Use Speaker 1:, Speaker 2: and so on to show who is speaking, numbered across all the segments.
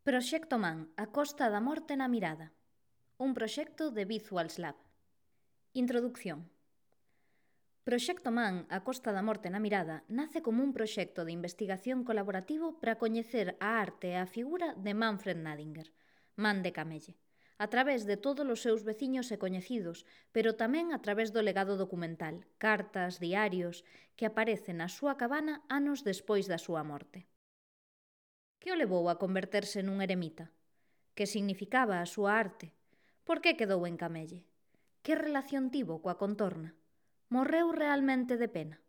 Speaker 1: Proxecto Man, a Costa da Morte na mirada. Un proxecto de Visuals Lab. Introducción. Proxecto Man, a Costa da Morte na mirada, nace como un proxecto de investigación colaborativo para coñecer a arte e a figura de Manfred Nadinger, Man de Camelle, a través de todos os seus veciños e coñecidos, pero tamén a través do legado documental, cartas, diarios, que aparecen na súa cabana anos despois da súa morte. Que o levou a converterse nun eremita? Que significaba a súa arte? Por que quedou en Camelle? Que relación tivo coa contorna? Morreu realmente de pena?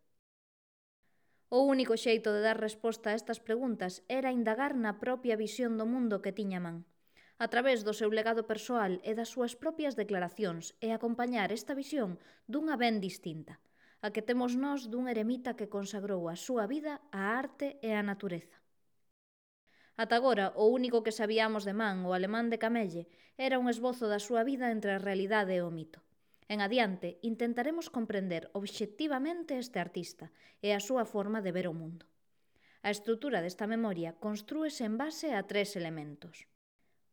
Speaker 1: O único xeito de dar resposta a estas preguntas era indagar na propia visión do mundo que tiña Man, a través do seu legado persoal e das súas propias declaracións e acompañar esta visión dunha ben distinta, a que temos nós dun eremita que consagrou a súa vida á arte e á natureza. Ata agora, o único que sabíamos de Man, o alemán de Camelle, era un esbozo da súa vida entre a realidade e o mito. En adiante, intentaremos comprender obxectivamente este artista e a súa forma de ver o mundo. A estrutura desta memoria constrúese en base a 3 elementos.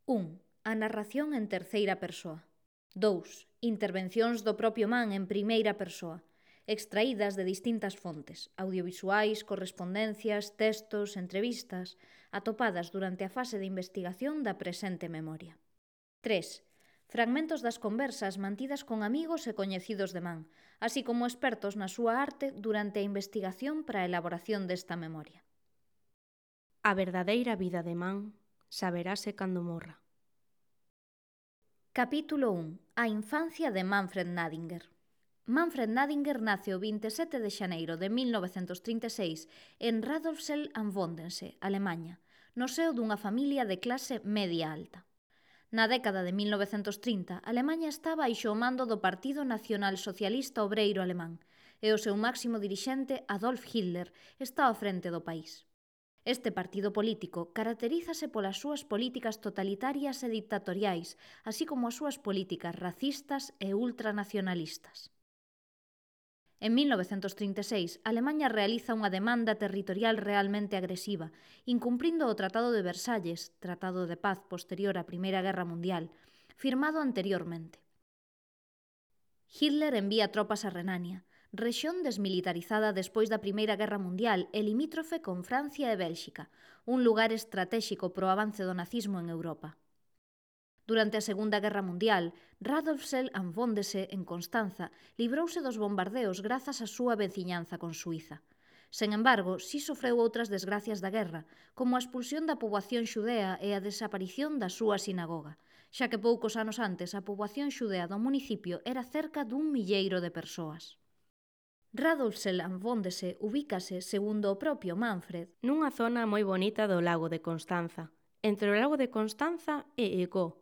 Speaker 1: 1. A narración en terceira persoa. 2. Intervencións do propio Man en primeira persoa, extraídas de distintas fontes, audiovisuais, correspondencias, textos, entrevistas, atopadas durante a fase de investigación da presente memoria. 3. Fragmentos das conversas mantidas con amigos e coñecidos de Man, así como expertos na súa arte durante a investigación para a elaboración desta memoria.
Speaker 2: A verdadeira vida de Man saberase cando morra.
Speaker 1: Capítulo 1. A infancia de Manfred Nadinger. Manfred Nadinger nace o 27 de xaneiro de 1936 en Radolfzell am Bodensee, Alemanha, no seo dunha familia de clase media alta. Na década de 1930, Alemanha estaba baixo o mando do Partido Nacional Socialista Obreiro Alemán e o seu máximo dirixente, Adolf Hitler, está ao frente do país. Este partido político caracterízase polas súas políticas totalitarias e dictatoriais, así como as súas políticas racistas e ultranacionalistas. En 1936, Alemanha realiza unha demanda territorial realmente agresiva, incumprindo o Tratado de Versalles, tratado de paz posterior á Primeira Guerra Mundial, firmado anteriormente. Hitler envía tropas a Renania, rexión desmilitarizada despois da Primeira Guerra Mundial e limítrofe con Francia e Bélxica, un lugar estratéxico pro avance do nazismo en Europa. Durante a Segunda Guerra Mundial, Radolfzell am Bodensee, en Constanza, librouse dos bombardeos grazas á súa veciñanza con Suíza. Sen embargo, si sofreu outras desgracias da guerra, como a expulsión da poboación xudea e a desaparición da súa sinagoga, xa que poucos anos antes a poboación xudea do municipio era cerca dun milleiro de persoas. Radolfzell am Bodensee ubícase, segundo o propio Manfred,
Speaker 2: nunha zona moi bonita do lago de Constanza, entre o lago de Constanza e Ego.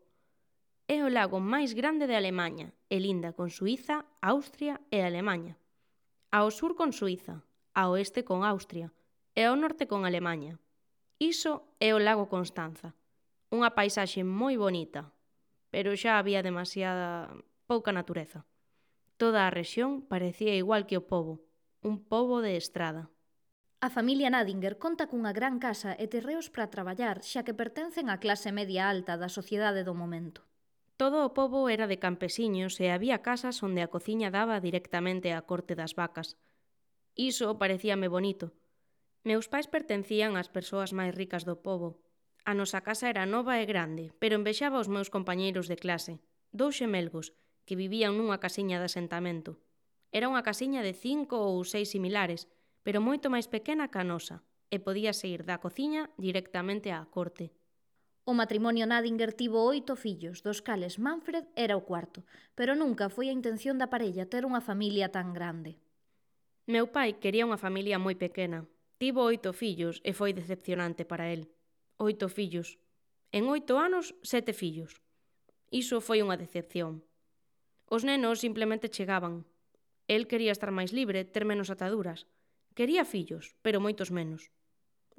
Speaker 2: É o lago máis grande de Alemaña e linda con Suíza, Austria e Alemaña. Ao sur con Suíza, ao oeste con Austria e ao norte con Alemaña. Iso é o lago Constanza, unha paisaxe moi bonita, pero xa había demasiada pouca natureza. Toda a rexión parecía igual que o pobo, un pobo de estrada.
Speaker 1: A familia Nadinger conta cunha gran casa e terreos para traballar xa que pertencen á clase media alta da sociedade do momento.
Speaker 2: Todo o pobo era de campesiños e había casas onde a cociña daba directamente á corte das vacas. Iso parecíame bonito. Meus pais pertencían ás persoas máis ricas do pobo. A nosa casa era nova e grande, pero envexaba os meus compañeiros de clase, 2 xemelgos, que vivían nunha casiña de asentamento. Era unha casiña de 5 ou 6 similares, pero moito máis pequena que a nosa, e podíase ir da cociña directamente á corte.
Speaker 1: O matrimonio Nadinger tivo 8 fillos, dos cales Manfred era o cuarto, pero nunca foi a intención da parella ter unha familia tan grande.
Speaker 2: Meu pai quería unha familia moi pequena. Tivo 8 fillos e foi decepcionante para el. 8 fillos. En 8 anos, 7 fillos. Iso foi unha decepción. Os nenos simplemente chegaban. El quería estar máis libre, ter menos ataduras. Quería fillos, pero moitos menos.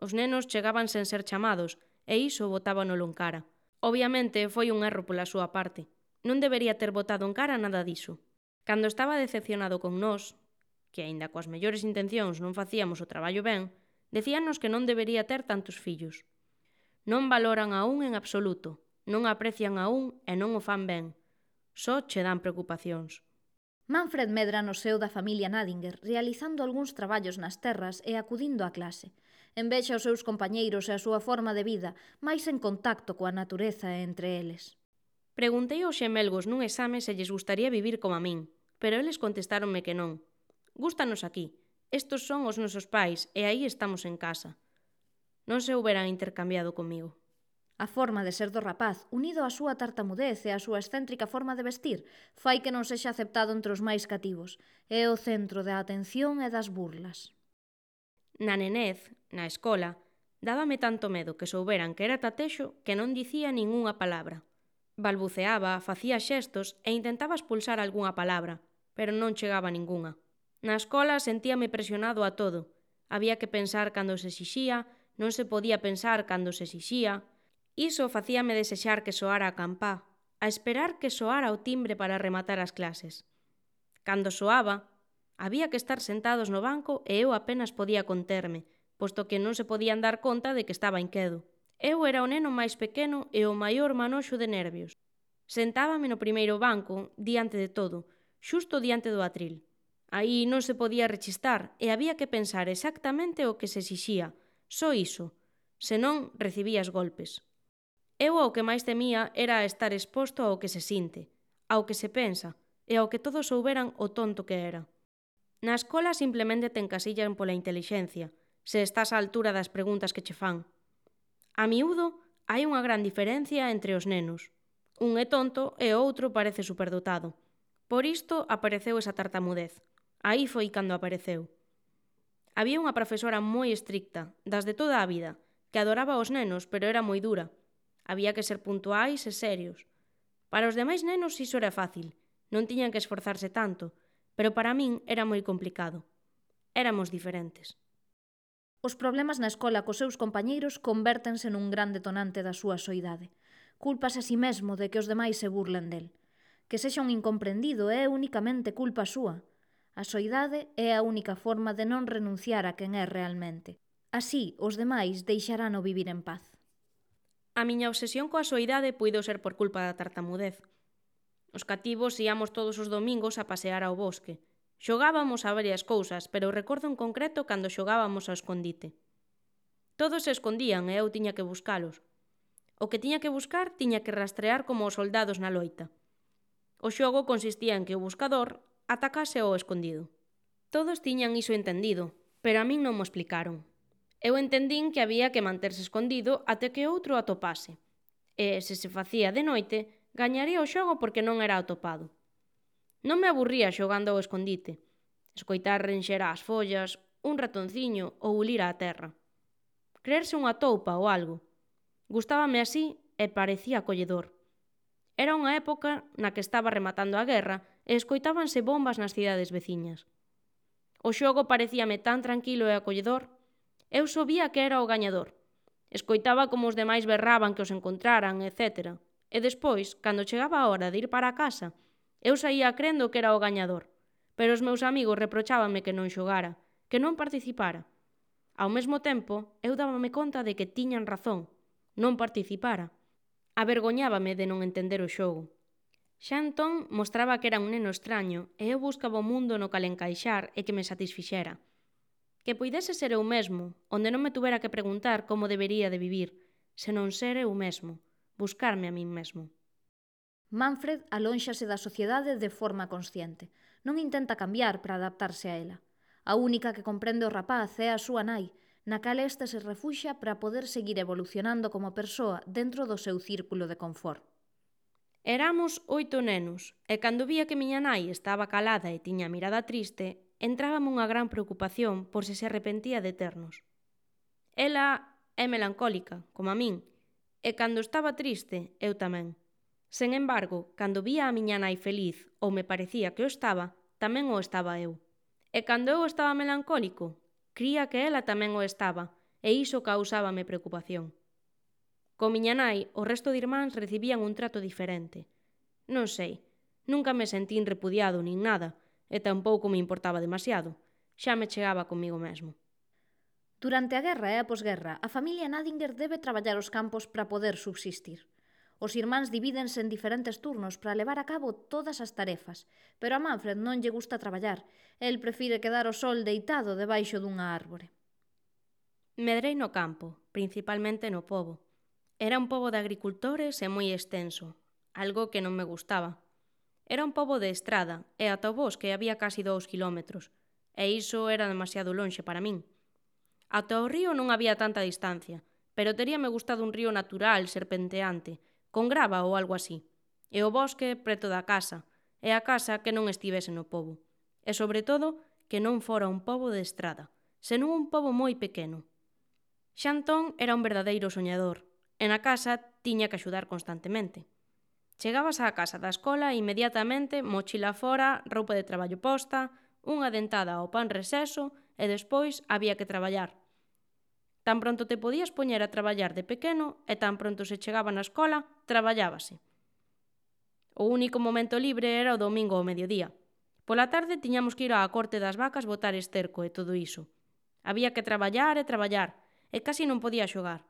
Speaker 2: Os nenos chegaban sen ser chamados, e iso botábanolo en cara. Obviamente foi un erro pola súa parte. Non debería ter botado en cara nada diso. Cando estaba decepcionado con nós, que aínda coas mellores intencións non facíamos o traballo ben, decíanos que non debería ter tantos fillos. Non valoran a un en absoluto, non aprecian a un e non o fan ben. Só che dan preocupacións.
Speaker 1: Manfred medra no seo da familia Nadinger, realizando algúns traballos nas terras e acudindo á clase. Envexa os seus compañeiros e a súa forma de vida, máis en contacto coa natureza e entre eles.
Speaker 2: Preguntei aos xemelgos nun exame se lles gustaría vivir como a min, pero eles contestáronme que non. Gústanos aquí, estos son os nosos pais e aí estamos en casa. Non se houberan intercambiado comigo.
Speaker 1: A forma de ser do rapaz, unido á súa tartamudez e á súa excéntrica forma de vestir, fai que non sexa aceptado entre os máis cativos. É o centro da atención e das burlas.
Speaker 2: Na nenez, na escola, dábame tanto medo que souberan que era tatexo que non dicía ningunha palabra. Balbuceaba, facía xestos e intentaba expulsar algunha palabra, pero non chegaba ningunha. Na escola sentíame presionado a todo. Había que pensar cando se exixía, non se podía pensar cando se exixía. Iso facíame desexar que soara a campá, a esperar que soara o timbre para rematar as clases. Cando soaba, había que estar sentados no banco e eu apenas podía conterme, posto que non se podían dar conta de que estaba inquedo. Eu era o neno máis pequeno e o maior manoxo de nervios. Sentábame no primeiro banco, diante de todo, xusto diante do atril. Aí non se podía rechistar e había que pensar exactamente o que se exixía, só iso, senón recibías golpes. Eu ao que máis temía era estar exposto ao que se sinte, ao que se pensa e ao que todos souberan o tonto que era. Na escola simplemente te encasillan pola intelixencia, se estás á altura das preguntas que che fan. A miúdo hai unha gran diferencia entre os nenos. Un é tonto e o outro parece superdotado. Por isto apareceu esa tartamudez. Aí foi cando apareceu. Había unha profesora moi estricta, das de toda a vida, que adoraba aos nenos, pero era moi dura. Había que ser puntuais e serios. Para os demais nenos iso era fácil, non tiñan que esforzarse tanto, pero para min era moi complicado. Éramos diferentes.
Speaker 1: Os problemas na escola cos seus compañeiros convértense nun gran detonante da súa soidade. Culpas a si mesmo de que os demais se burlen del. Que sexa un incomprendido é únicamente culpa súa. A soidade é a única forma de non renunciar a quen é realmente. Así, os demais deixarán o vivir en paz.
Speaker 2: A miña obsesión coa soidade puido ser por culpa da tartamudez. Os cativos íamos todos os domingos a pasear ao bosque. Xogábamos a varias cousas, pero recordo en concreto cando xogábamos ao escondite. Todos se escondían e eu tiña que buscalos. O que tiña que buscar tiña que rastrear como os soldados na loita. O xogo consistía en que o buscador atacase ao escondido. Todos tiñan iso entendido, pero a min non mo explicaron. Eu entendín que había que manterse escondido até que outro atopase. E, se se facía de noite, gañaría o xogo porque non era atopado. Non me aburría xogando ao escondite. Escoitar renxer as follas, un ratonciño ou ulir á terra. Creerse unha toupa ou algo. Gustábame así e parecía acolledor. Era unha época na que estaba rematando a guerra e escoitábanse bombas nas cidades veciñas. O xogo parecíame tan tranquilo e acolledor. Eu sabía que era o gañador. Escoitaba como os demais berraban que os encontraran, etc. E despois, cando chegaba a hora de ir para a casa, eu saía crendo que era o gañador. Pero os meus amigos reprochábanme que non xogara, que non participara. Ao mesmo tempo, eu dábame conta de que tiñan razón. Non participara. Avergoñábame de non entender o xogo. Xa entón mostraba que era un neno extraño e eu buscaba o mundo no cal encaixar e que me satisfixera. Que puidese ser eu mesmo, onde non me tuvera que preguntar como debería de vivir, senón ser eu mesmo, buscarme a min mesmo.
Speaker 1: Manfred alónxase da sociedade de forma consciente. Non intenta cambiar para adaptarse a ela. A única que comprende o rapaz é a súa nai, na cal este se refuxa para poder seguir evolucionando como persoa dentro do seu círculo de confort.
Speaker 2: Éramos 8 nenos, e cando vía que miña nai estaba calada e tiña a mirada triste, entrábame unha gran preocupación por se arrepentía de ternos. Ela é melancólica, como a min, e cando estaba triste, eu tamén. Sen embargo, cando vía a miña nai feliz, ou me parecía que o estaba, tamén o estaba eu. E cando eu estaba melancólico, cría que ela tamén o estaba, e iso causábame preocupación. Co miña nai, o resto de irmáns recibían un trato diferente. Non sei, nunca me sentín repudiado nin nada, e tampouco me importaba demasiado. Xa me chegaba comigo mesmo.
Speaker 1: Durante a guerra e a posguerra, a familia Nadinger debe traballar os campos para poder subsistir. Os irmáns divídense en diferentes turnos para levar a cabo todas as tarefas, pero a Manfred non lle gusta traballar. El prefire quedar ao sol deitado debaixo dunha árbore.
Speaker 2: Medrei no campo, principalmente no pobo. Era un pobo de agricultores e moi extenso, algo que non me gustaba. Era un pobo de estrada e ata o bosque había casi 2 kilómetros, e iso era demasiado lonxe para min. Ata o río non había tanta distancia, pero teríame gustado un río natural, serpenteante, con grava ou algo así, e o bosque preto da casa, e a casa que non estivese no pobo, e sobre todo que non fora un pobo de estrada, senón un pobo moi pequeno. Xa entón era un verdadeiro soñador, e na casa tiña que axudar constantemente. Chegabas á casa da escola e inmediatamente mochila fora, roupa de traballo posta, unha dentada ao pan reseso e despois había que traballar. Tan pronto te podías poñer a traballar de pequeno e tan pronto se chegaba na escola, traballábase. O único momento libre era o domingo ao mediodía. Pola tarde tiñamos que ir á corte das vacas botar esterco e todo iso. Había que traballar e traballar, e casi non podía xogar.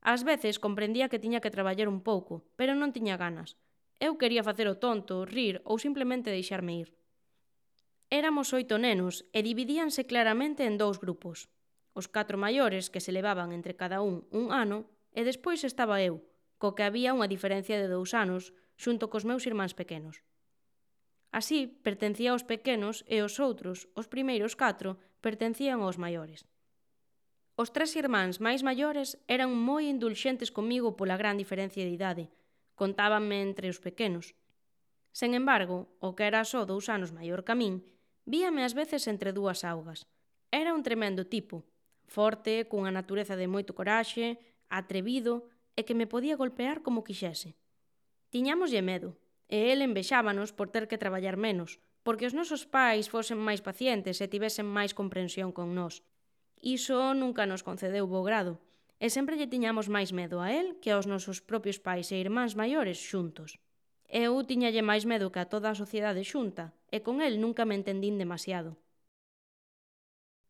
Speaker 2: Ás veces comprendía que tiña que traballar un pouco, pero non tiña ganas. Eu quería facer o tonto, rir ou simplemente deixarme ir. Éramos 8 nenos e dividíanse claramente en 2 grupos. Os 4 maiores, que se levaban entre cada un ano, e despois estaba eu, co que había unha diferencia de 2 anos, xunto cos meus irmáns pequenos. Así, pertencía aos pequenos e os outros, os primeiros 4, pertencían aos maiores. Os 3 irmáns máis maiores eran moi indulxentes comigo pola gran diferencia de idade. Contábanme entre os pequenos. Sen embargo, o que era só 2 anos maior que a min, víame ás veces entre 2 augas. Era un tremendo tipo, forte, cunha natureza de moito coraxe, atrevido e que me podía golpear como quixese. Tiñámoslle medo, e el envexábanos por ter que traballar menos, porque os nosos pais fosen máis pacientes e tivesen máis comprensión con nós. Iso nunca nos concedeu bo grado, e sempre lle tiñamos máis medo a el que aos nosos propios pais e irmáns maiores xuntos. Eu tiñalle máis medo que a toda a sociedade xunta, e con el nunca me entendín demasiado.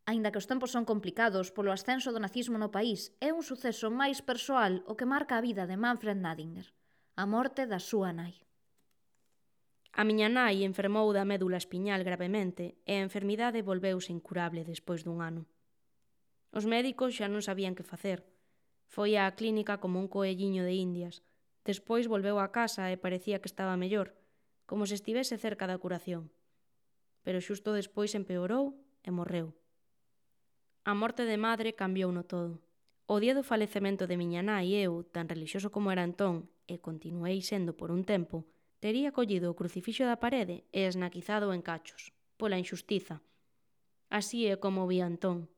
Speaker 1: Aínda que os tempos son complicados polo ascenso do nazismo no país, é un suceso máis persoal o que marca a vida de Manfred Nadinger, a morte da súa nai.
Speaker 2: A miña nai enfermou da médula espiñal gravemente e a enfermidade volveuse incurable despois dun ano. Os médicos xa non sabían que facer. Foi á clínica como un coelliño de indias. Despois volveu á casa e parecía que estaba mellor, como se estivese cerca da curación. Pero xusto despois empeorou e morreu. A morte de madre cambiouno todo. O día do falecemento de miña nai eu, tan relixioso como era entón, e continuei sendo por un tempo, tería collido o crucifixo da parede e esnaquizado en cachos, pola injustiza. Así é como vi Antón.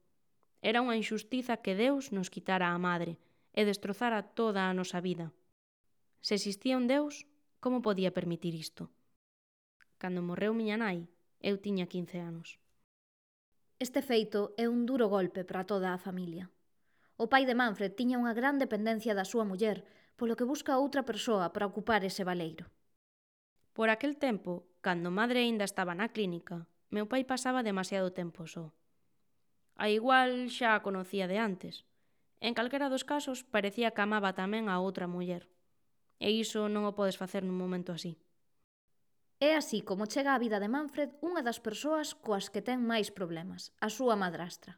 Speaker 2: Era unha injustiza que Deus nos quitara a madre e destrozara toda a nosa vida. Se existía un Deus, como podía permitir isto? Cando morreu miña nai, eu tiña 15 anos.
Speaker 1: Este feito é un duro golpe para toda a familia. O pai de Manfred tiña unha gran dependencia da súa muller, polo que busca outra persoa para ocupar ese baleiro.
Speaker 2: Por aquel tempo, cando madre aínda estaba na clínica, meu pai pasaba demasiado tempo só. A igual xa a conocía de antes. En calquera dos casos, parecía que amaba tamén a outra muller. E iso non o podes facer nun momento así.
Speaker 1: É así como chega á vida de Manfred unha das persoas coas que ten máis problemas, a súa madrastra.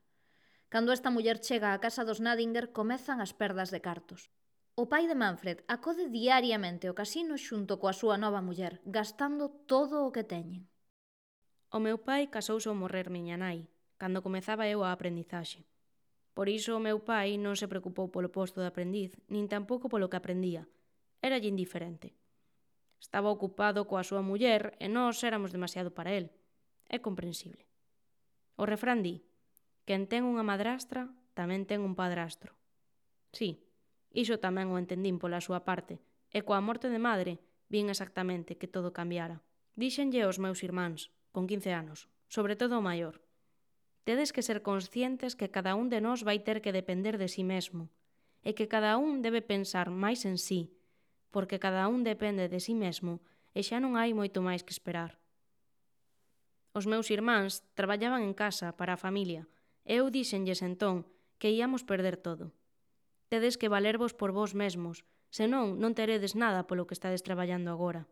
Speaker 1: Cando esta muller chega á casa dos Nadinger, comezan as perdas de cartos. O pai de Manfred acode diariamente ao casino xunto coa súa nova muller, gastando todo o que teñen.
Speaker 2: O meu pai casouse ao morrer miña nai, cando comezaba eu a aprendizaxe. Por iso o meu pai non se preocupou polo posto de aprendiz, nin tampouco polo que aprendía. Éralle indiferente. Estaba ocupado coa súa muller e nós éramos demasiado para el. É comprensible. O refrán di: quen ten unha madrastra tamén ten un padrastro. Sí, iso tamén o entendín pola súa parte, e coa morte de madre vin exactamente que todo cambiara. Díxenlle aos meus irmáns, con 15 anos, sobre todo o maior: tedes que ser conscientes que cada un de nós vai ter que depender de si mesmo, e que cada un debe pensar máis en si, porque cada un depende de si mesmo e xa non hai moito máis que esperar. Os meus irmáns traballaban en casa para a familia e eu díxenlles entón que íamos perder todo. Tedes que valervos por vós mesmos, senón non teredes nada polo que estades traballando agora.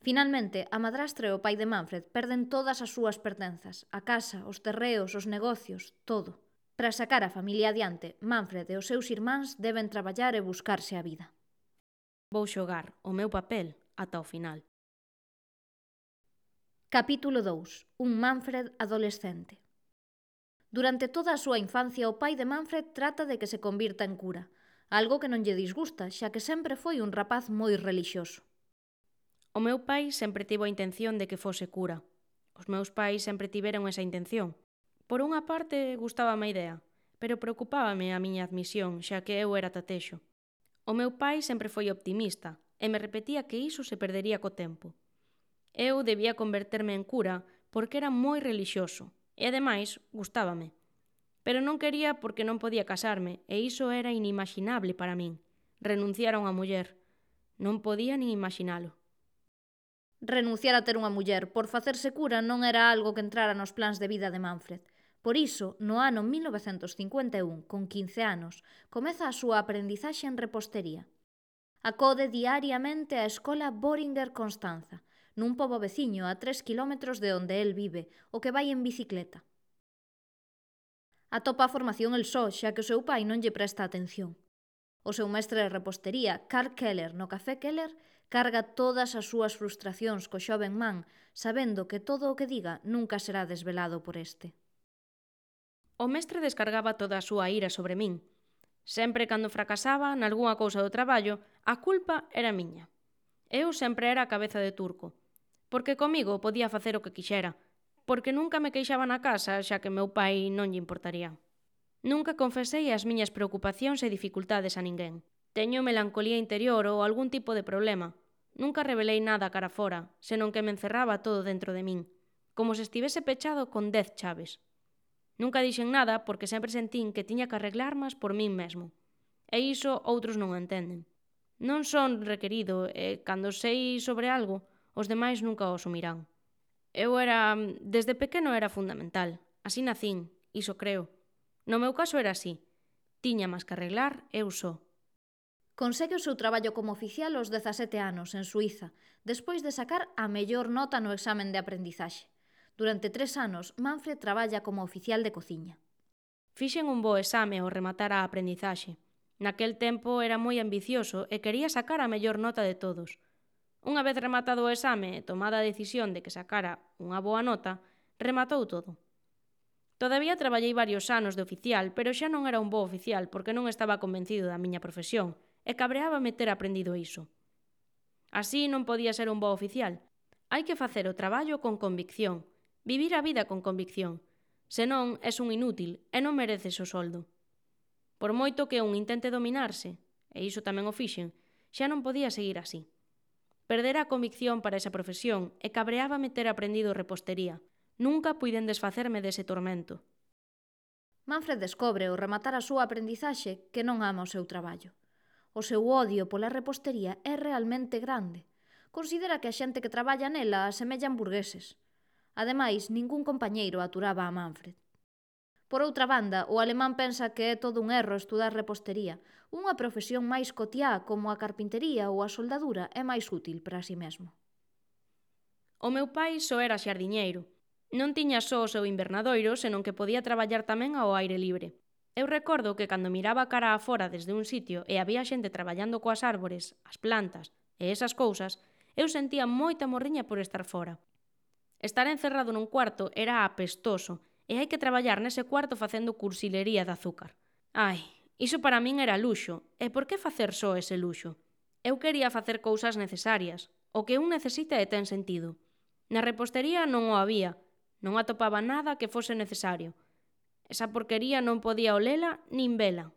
Speaker 1: Finalmente, a madrastra e o pai de Manfred perden todas as súas pertenzas, a casa, os terreos, os negocios, todo. Para sacar a familia adiante, Manfred e os seus irmáns deben traballar e buscarse a vida.
Speaker 2: Vou xogar o meu papel ata o final.
Speaker 1: Capítulo 2. Un Manfred adolescente. Durante toda a súa infancia, o pai de Manfred trata de que se convirta en cura, algo que non lle disgusta, xa que sempre foi un rapaz moi relixioso.
Speaker 2: O meu pai sempre tivo a intención de que fose cura. Os meus pais sempre tiveron esa intención. Por unha parte, gustábame a idea, pero preocupábame a miña admisión, xa que eu era tatexo. O meu pai sempre foi optimista e me repetía que iso se perdería co tempo. Eu debía converterme en cura porque era moi relixioso e, ademais, gustábame. Pero non quería porque non podía casarme e iso era inimaginable para min. Renunciar a unha muller. Non podía nin imaginalo.
Speaker 1: Renunciar a ter unha muller por facerse cura non era algo que entrara nos plans de vida de Manfred. Por iso, no ano 1951, con 15 anos, comeza a súa aprendizaxe en repostería. Acode diariamente á escola Boehringer Constanza, nun pobo veciño a 3 kilómetros de onde el vive, o que vai en bicicleta. Atopa a formación el só, xa que o seu pai non lle presta atención. O seu mestre de repostería, Karl Keller, no Café Keller, carga todas as súas frustracións co xoven man, sabendo que todo o que diga nunca será desvelado por este.
Speaker 2: O mestre descargaba toda a súa ira sobre min. Sempre cando fracasaba nalgúna cousa do traballo, a culpa era miña. Eu sempre era a cabeza de turco, porque comigo podía facer o que quixera, porque nunca me queixaba na casa, xa que meu pai non lle importaría. Nunca confesei as miñas preocupacións e dificultades a ninguén. Teño melancolía interior ou algún tipo de problema. Nunca revelei nada cara fora, senón que me encerraba todo dentro de min, como se estivese pechado con 10 chaves. Nunca dixen nada porque sempre sentín que tiña que arreglarmas por min mesmo. E iso outros non entenden. Non son requerido e, cando sei sobre algo, os demais nunca o asumirán. Desde pequeno era fundamental. Así nacín, iso creo. No meu caso era así. Tiña máis que arreglar eu só.
Speaker 1: Consegue o seu traballo como oficial aos 17 anos, en Suíza, despois de sacar a mellor nota no examen de aprendizaxe. Durante 3 anos, Manfred traballa como oficial de cociña.
Speaker 2: Fixen un bo exame ao rematar a aprendizaxe. Naquel tempo era moi ambicioso e quería sacar a mellor nota de todos. Unha vez rematado o exame e tomada a decisión de que sacara unha boa nota, rematou todo. Todavía traballei varios anos de oficial, pero xa non era un bo oficial porque non estaba convencido da miña profesión e cabreábame ter aprendido iso. Así non podía ser un bo oficial. Hai que facer o traballo con convicción, vivir a vida con convicción. Senón, és un inútil e non mereces o soldo. Por moito que un intente dominarse, e iso tamén o fixen, xa non podía seguir así. Perdera a convicción para esa profesión e cabreábame ter aprendido repostería. Nunca puiden desfacerme dese tormento.
Speaker 1: Manfred descobre ao rematar a súa aprendizaxe que non ama o seu traballo. O seu odio pola repostería é realmente grande. Considera que a xente que traballa nela asemellan burgueses. Ademais, ningún compañeiro aturaba a Manfred. Por outra banda, o alemán pensa que é todo un erro estudar repostería. Unha profesión máis cotiá como a carpintería ou a soldadura é máis útil para si mesmo.
Speaker 2: O meu pai só era xardiñeiro. Non tiña só o seu invernadoiro, senón que podía traballar tamén ao aire libre. Eu recordo que cando miraba cara a fora desde un sitio e había xente traballando coas árbores, as plantas e esas cousas, eu sentía moita morriña por estar fora. Estar encerrado nun cuarto era apestoso e hai que traballar nese cuarto facendo cursilería de azúcar. Ai, iso para min era luxo, e por que facer só ese luxo? Eu quería facer cousas necesarias, o que un necesita e ten sentido. Na repostería non o había, non atopaba nada que fose necesario. Esa porquería non podía olela nin vela.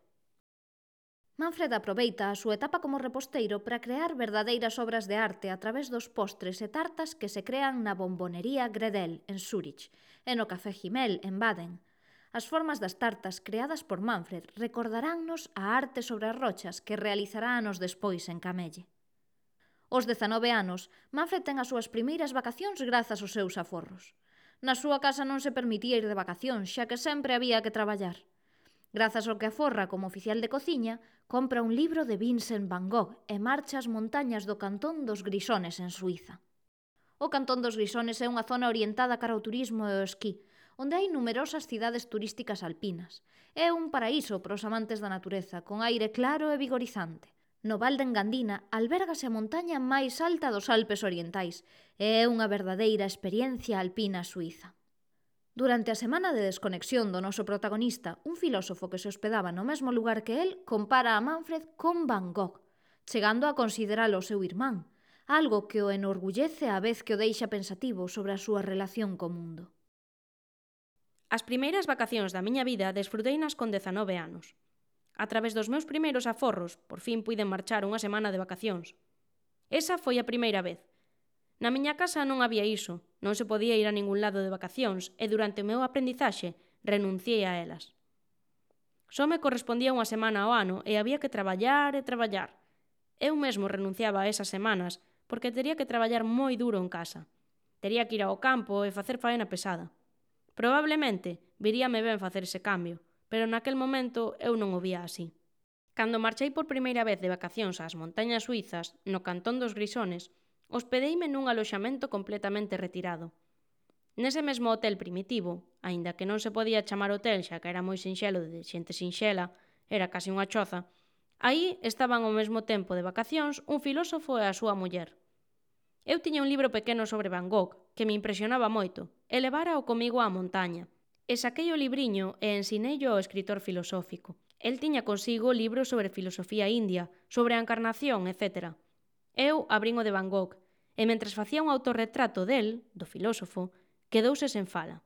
Speaker 1: Manfred aproveita a súa etapa como reposteiro para crear verdadeiras obras de arte a través dos postres e tartas que se crean na bombonería Gredel, en Zúrich, e no Café Himmel, en Baden. As formas das tartas creadas por Manfred recordaránnos a arte sobre as rochas que realizará anos despois en Camelle. Aos 19 anos, Manfred ten as súas primeiras vacacións grazas aos seus aforros. Na súa casa non se permitía ir de vacacións, xa que sempre había que traballar. Grazas ao que aforra como oficial de cociña, compra un libro de Vincent van Gogh e marcha ás montañas do cantón dos Grisones en Suíza. O cantón dos Grisones é unha zona orientada cara ao turismo e ao esquí, onde hai numerosas cidades turísticas alpinas. É un paraíso para os amantes da natureza, con aire claro e vigorizante. No Val de Engandina albérgase a montaña máis alta dos Alpes orientais e é unha verdadeira experiencia alpina suíza. Durante a semana de desconexión do noso protagonista, un filósofo que se hospedaba no mesmo lugar que el compara a Manfred con Van Gogh, chegando a consideralo o seu irmán, algo que o enorgullece á vez que o deixa pensativo sobre a súa relación co mundo.
Speaker 2: As primeiras vacacións da miña vida desfruteinas con 19 anos. A través dos meus primeiros aforros, por fin puiden marchar unha semana de vacacións. Esa foi a primeira vez. Na miña casa non había iso, non se podía ir a ningún lado de vacacións e durante o meu aprendizaxe renunciei a elas. Só me correspondía unha semana ao ano e había que traballar e traballar. Eu mesmo renunciaba a esas semanas porque tería que traballar moi duro en casa. Tería que ir ao campo e facer faena pesada. Probablemente viríame ben facer ese cambio, pero naquel momento eu non o vía así. Cando marchei por primeira vez de vacacións ás montañas suizas, no cantón dos Grisones, hospedeime nun aloxamento completamente retirado. Nese mesmo hotel primitivo, aínda que non se podía chamar hotel xa que era moi sinxelo de xente sinxela, era case unha choza, aí estaban ao mesmo tempo de vacacións un filósofo e a súa muller. Eu tiña un libro pequeno sobre Van Gogh, que me impresionaba moito, e levárao comigo á montaña. E saquei o libriño e ensineillo ao escritor filosófico. El tiña consigo libros sobre filosofía india, sobre a encarnación, etc. Eu abrín o de Van Gogh, e mentres facía un autorretrato del, do filósofo, quedouse sen fala.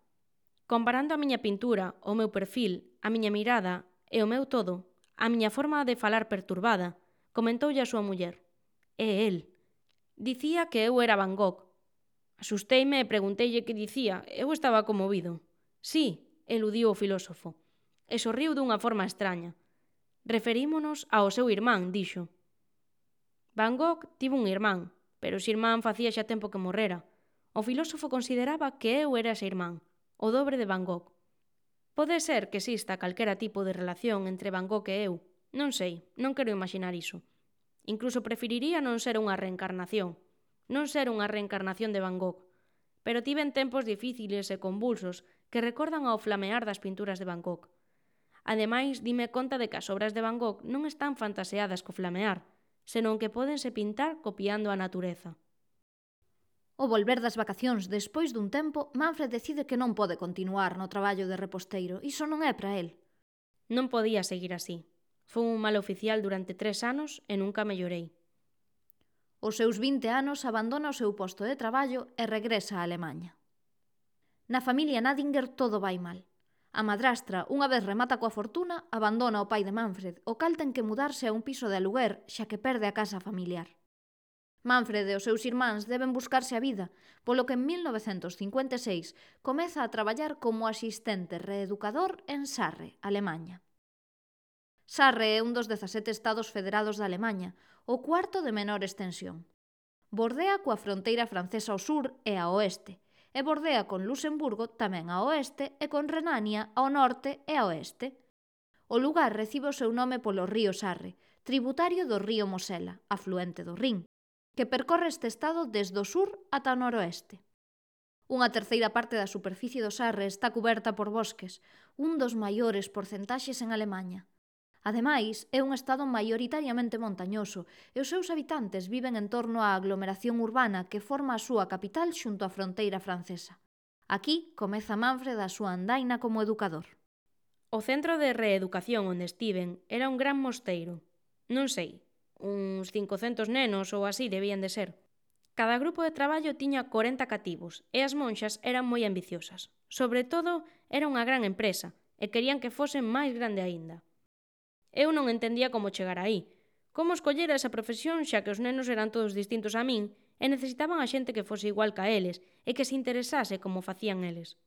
Speaker 2: Comparando a miña pintura, o meu perfil, a miña mirada e o meu todo, a miña forma de falar perturbada, comentoulle a súa muller. É el. Dicía que eu era Van Gogh. Asusteime e pregunteille que dicía, eu estaba conmovido. Sí, eludiu o filósofo, e sorriu dunha forma extraña. Referímonos ao seu irmán, dixo. Van Gogh tivo un irmán, pero ese irmán facía xa tempo que morrera. O filósofo consideraba que eu era ese irmán, o dobre de Van Gogh. Pode ser que exista calquera tipo de relación entre Van Gogh e eu. Non sei, non quero imaginar iso. Incluso preferiría non ser unha reencarnación de Van Gogh. Pero tiven tempos difíciles e convulsos que recordan ao flamear das pinturas de Van Gogh. Ademais, dime conta de que as obras de Van Gogh non están fantaseadas co flamear, senón que pódense pintar copiando a natureza.
Speaker 1: Ao volver das vacacións despois dun tempo, Manfred decide que non pode continuar no traballo de reposteiro. Iso non é para el.
Speaker 2: Non podía seguir así. Fui un mal oficial durante 3 anos e nunca mellorei.
Speaker 1: Aos seus 20 anos abandona o seu posto de traballo e regresa a Alemanha. Na familia Nadinger todo vai mal. A madrastra, unha vez remata coa fortuna, abandona o pai de Manfred, o cal ten que mudarse a un piso de aluguer xa que perde a casa familiar. Manfred e os seus irmáns deben buscarse a vida, polo que en 1956 comeza a traballar como asistente reeducador en Sarre, Alemanha. Sarre é un dos 17 estados federados da Alemanha, o cuarto de menor extensión. Bordea coa fronteira francesa ao sur e ao oeste, e bordea con Luxemburgo tamén ao oeste e con Renania ao norte e ao oeste. O lugar recibe o seu nome polo río Sarre, tributario do río Mosela, afluente do Rin, que percorre este estado desde o sur ata o noroeste. Unha terceira parte da superficie do Sarre está cuberta por bosques, un dos maiores porcentaxes en Alemanha. Ademais, é un estado maioritariamente montañoso e os seus habitantes viven en torno á aglomeración urbana que forma a súa capital xunto á fronteira francesa. Aquí comeza Manfred a súa andaina como educador.
Speaker 2: O centro de reeducación onde estiven era un gran mosteiro. Non sei, uns 500 nenos ou así debían de ser. Cada grupo de traballo tiña 40 cativos e as monxas eran moi ambiciosas. Sobre todo, era unha gran empresa e querían que fose máis grande aínda. Eu non entendía como chegar aí, como escoller esa profesión xa que os nenos eran todos distintos a min e necesitaban a xente que fose igual ca eles e que se interesase como facían eles.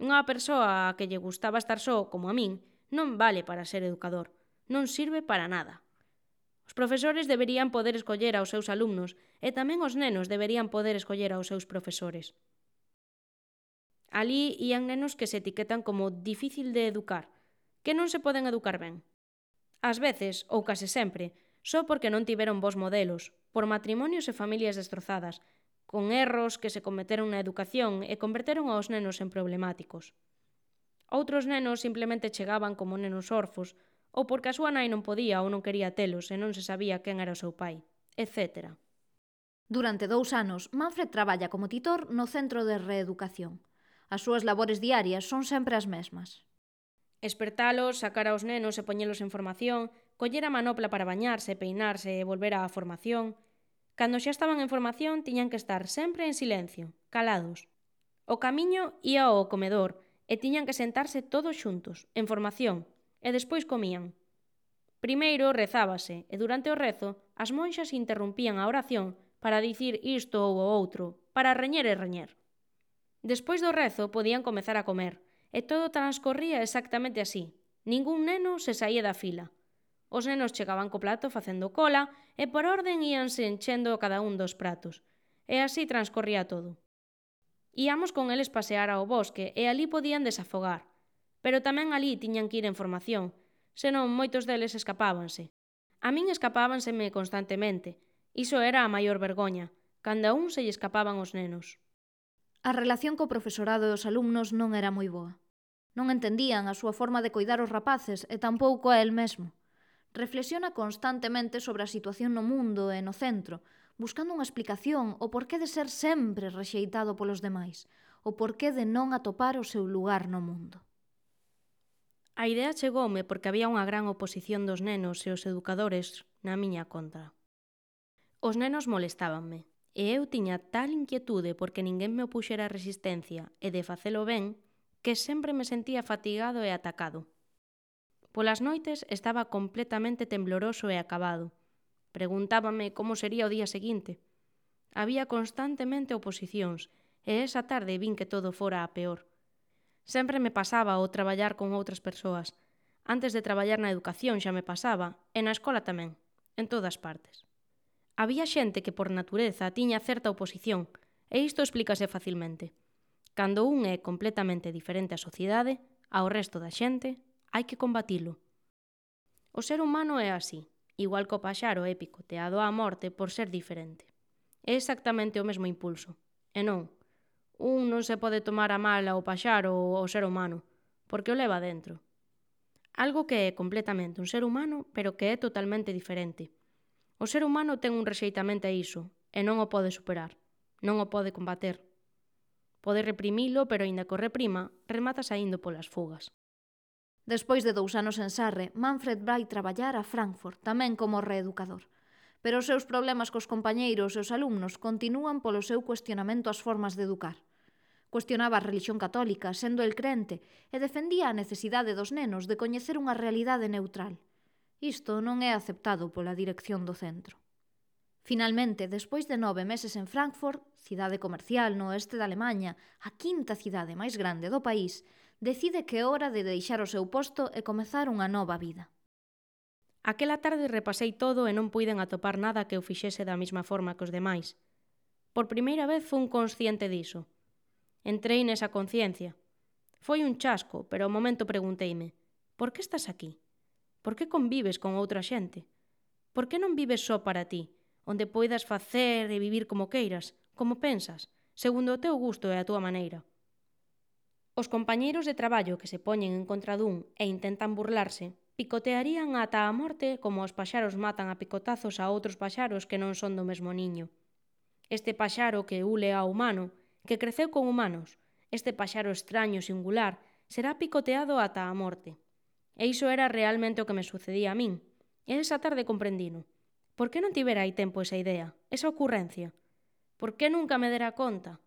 Speaker 2: Unha persoa a que lle gustaba estar só, como a min, non vale para ser educador, non sirve para nada. Os profesores deberían poder escoller aos seus alumnos e tamén os nenos deberían poder escoller aos seus profesores. Alí ían nenos que se etiquetan como difícil de educar, que non se poden educar ben. Ás veces, ou case sempre, só porque non tiveron bons modelos, por matrimonios e familias destrozadas, con erros que se cometeron na educación e converteron aos nenos en problemáticos. Outros nenos simplemente chegaban como nenos orfos, ou porque a súa nai non podía ou non quería telos e non se sabía quen era o seu pai, etc.
Speaker 1: Durante 2 anos, Manfred traballa como titor no Centro de Reeducación. As súas labores diarias son sempre as mesmas.
Speaker 2: Espertalos, sacar aos nenos e poñelos en formación, coller a manopla para bañarse, peinarse e volver á formación. Cando xa estaban en formación, tiñan que estar sempre en silencio, calados. O camiño ía ao comedor e tiñan que sentarse todos xuntos, en formación, e despois comían. Primeiro rezábase e durante o rezo as monxas interrompían a oración para dicir isto ou o outro, para reñer e reñer. Despois do rezo podían comezar a comer, e todo transcorría exactamente así. Ningún neno se saía da fila. Os nenos chegaban co plato facendo cola e por orden íanse enchendo cada un dos pratos. E así transcorría todo. Íamos con eles pasear ao bosque e alí podían desafogar. Pero tamén alí tiñan que ir en formación, senón moitos deles escapábanse. A min escapábanseme constantemente. Iso era a maior vergoña, cando a un se lle escapaban os nenos.
Speaker 1: A relación co profesorado e os alumnos non era moi boa. Non entendían a súa forma de coidar os rapaces e tampouco a el mesmo. Reflexiona constantemente sobre a situación no mundo e no centro, buscando unha explicación o porqué de ser sempre rexeitado polos demais, o porqué de non atopar o seu lugar no mundo.
Speaker 2: A idea chegoume porque había unha gran oposición dos nenos e os educadores na miña contra. Os nenos molestábanme, e eu tiña tal inquietude porque ninguén me opuxera resistencia e de facelo ben, que sempre me sentía fatigado e atacado. Polas noites estaba completamente tembloroso e acabado. Preguntábame como sería o día seguinte. Había constantemente oposicións, e esa tarde vin que todo fora a peor. Sempre me pasaba o traballar con outras persoas. Antes de traballar na educación xa me pasaba, e na escola tamén, en todas partes. Había xente que por natureza tiña certa oposición, e isto explícase facilmente. Cando un é completamente diferente á sociedade, ao resto da xente, hai que combatilo. O ser humano é así, igual que o paxaro é picoteado á morte por ser diferente. É exactamente o mesmo impulso. E non, un non se pode tomar a mal ao paxaro ou ao ser humano, porque o leva dentro. Algo que é completamente un ser humano, pero que é totalmente diferente. O ser humano ten un rexeitamento a iso, e non o pode superar, non o pode combater. Pode reprimilo, pero aínda que o reprima, remata saindo polas fugas.
Speaker 1: Despois de 2 anos en Sarre, Manfred vai traballar a Frankfurt, tamén como reeducador. Pero os seus problemas cos compañeiros e os alumnos continúan polo seu cuestionamento ás formas de educar. Cuestionaba a relixión católica, sendo el crente, e defendía a necesidade dos nenos de coñecer unha realidade neutral. Isto non é aceptado pola dirección do centro. Finalmente, despois de 9 meses en Frankfurt, cidade comercial no oeste da Alemanha, a 5ª cidade máis grande do país, decide que é hora de deixar o seu posto e comezar unha nova vida.
Speaker 2: Aquela tarde repasei todo e non puiden atopar nada que o fixese da mesma forma que os demais. Por primeira vez fun consciente diso. Entrei nesa conciencia. Foi un chasco, pero ao momento pregunteime: por que estás aquí? Por que convives con outra xente? Por que non vives só para ti, onde poidas facer e vivir como queiras, como pensas, segundo o teu gusto e a túa maneira? Os compañeiros de traballo que se poñen en contra dun e intentan burlarse, picotearían ata a morte como os paxaros matan a picotazos a outros paxaros que non son do mesmo niño. Este paxaro que ule ao humano, que creceu con humanos, este paxaro extraño e singular, será picoteado ata a morte. E iso era realmente o que me sucedía a min. E esa tarde comprendino. Por que non tivera hai tempo esa idea, esa ocurrencia? Por que nunca me dera conta?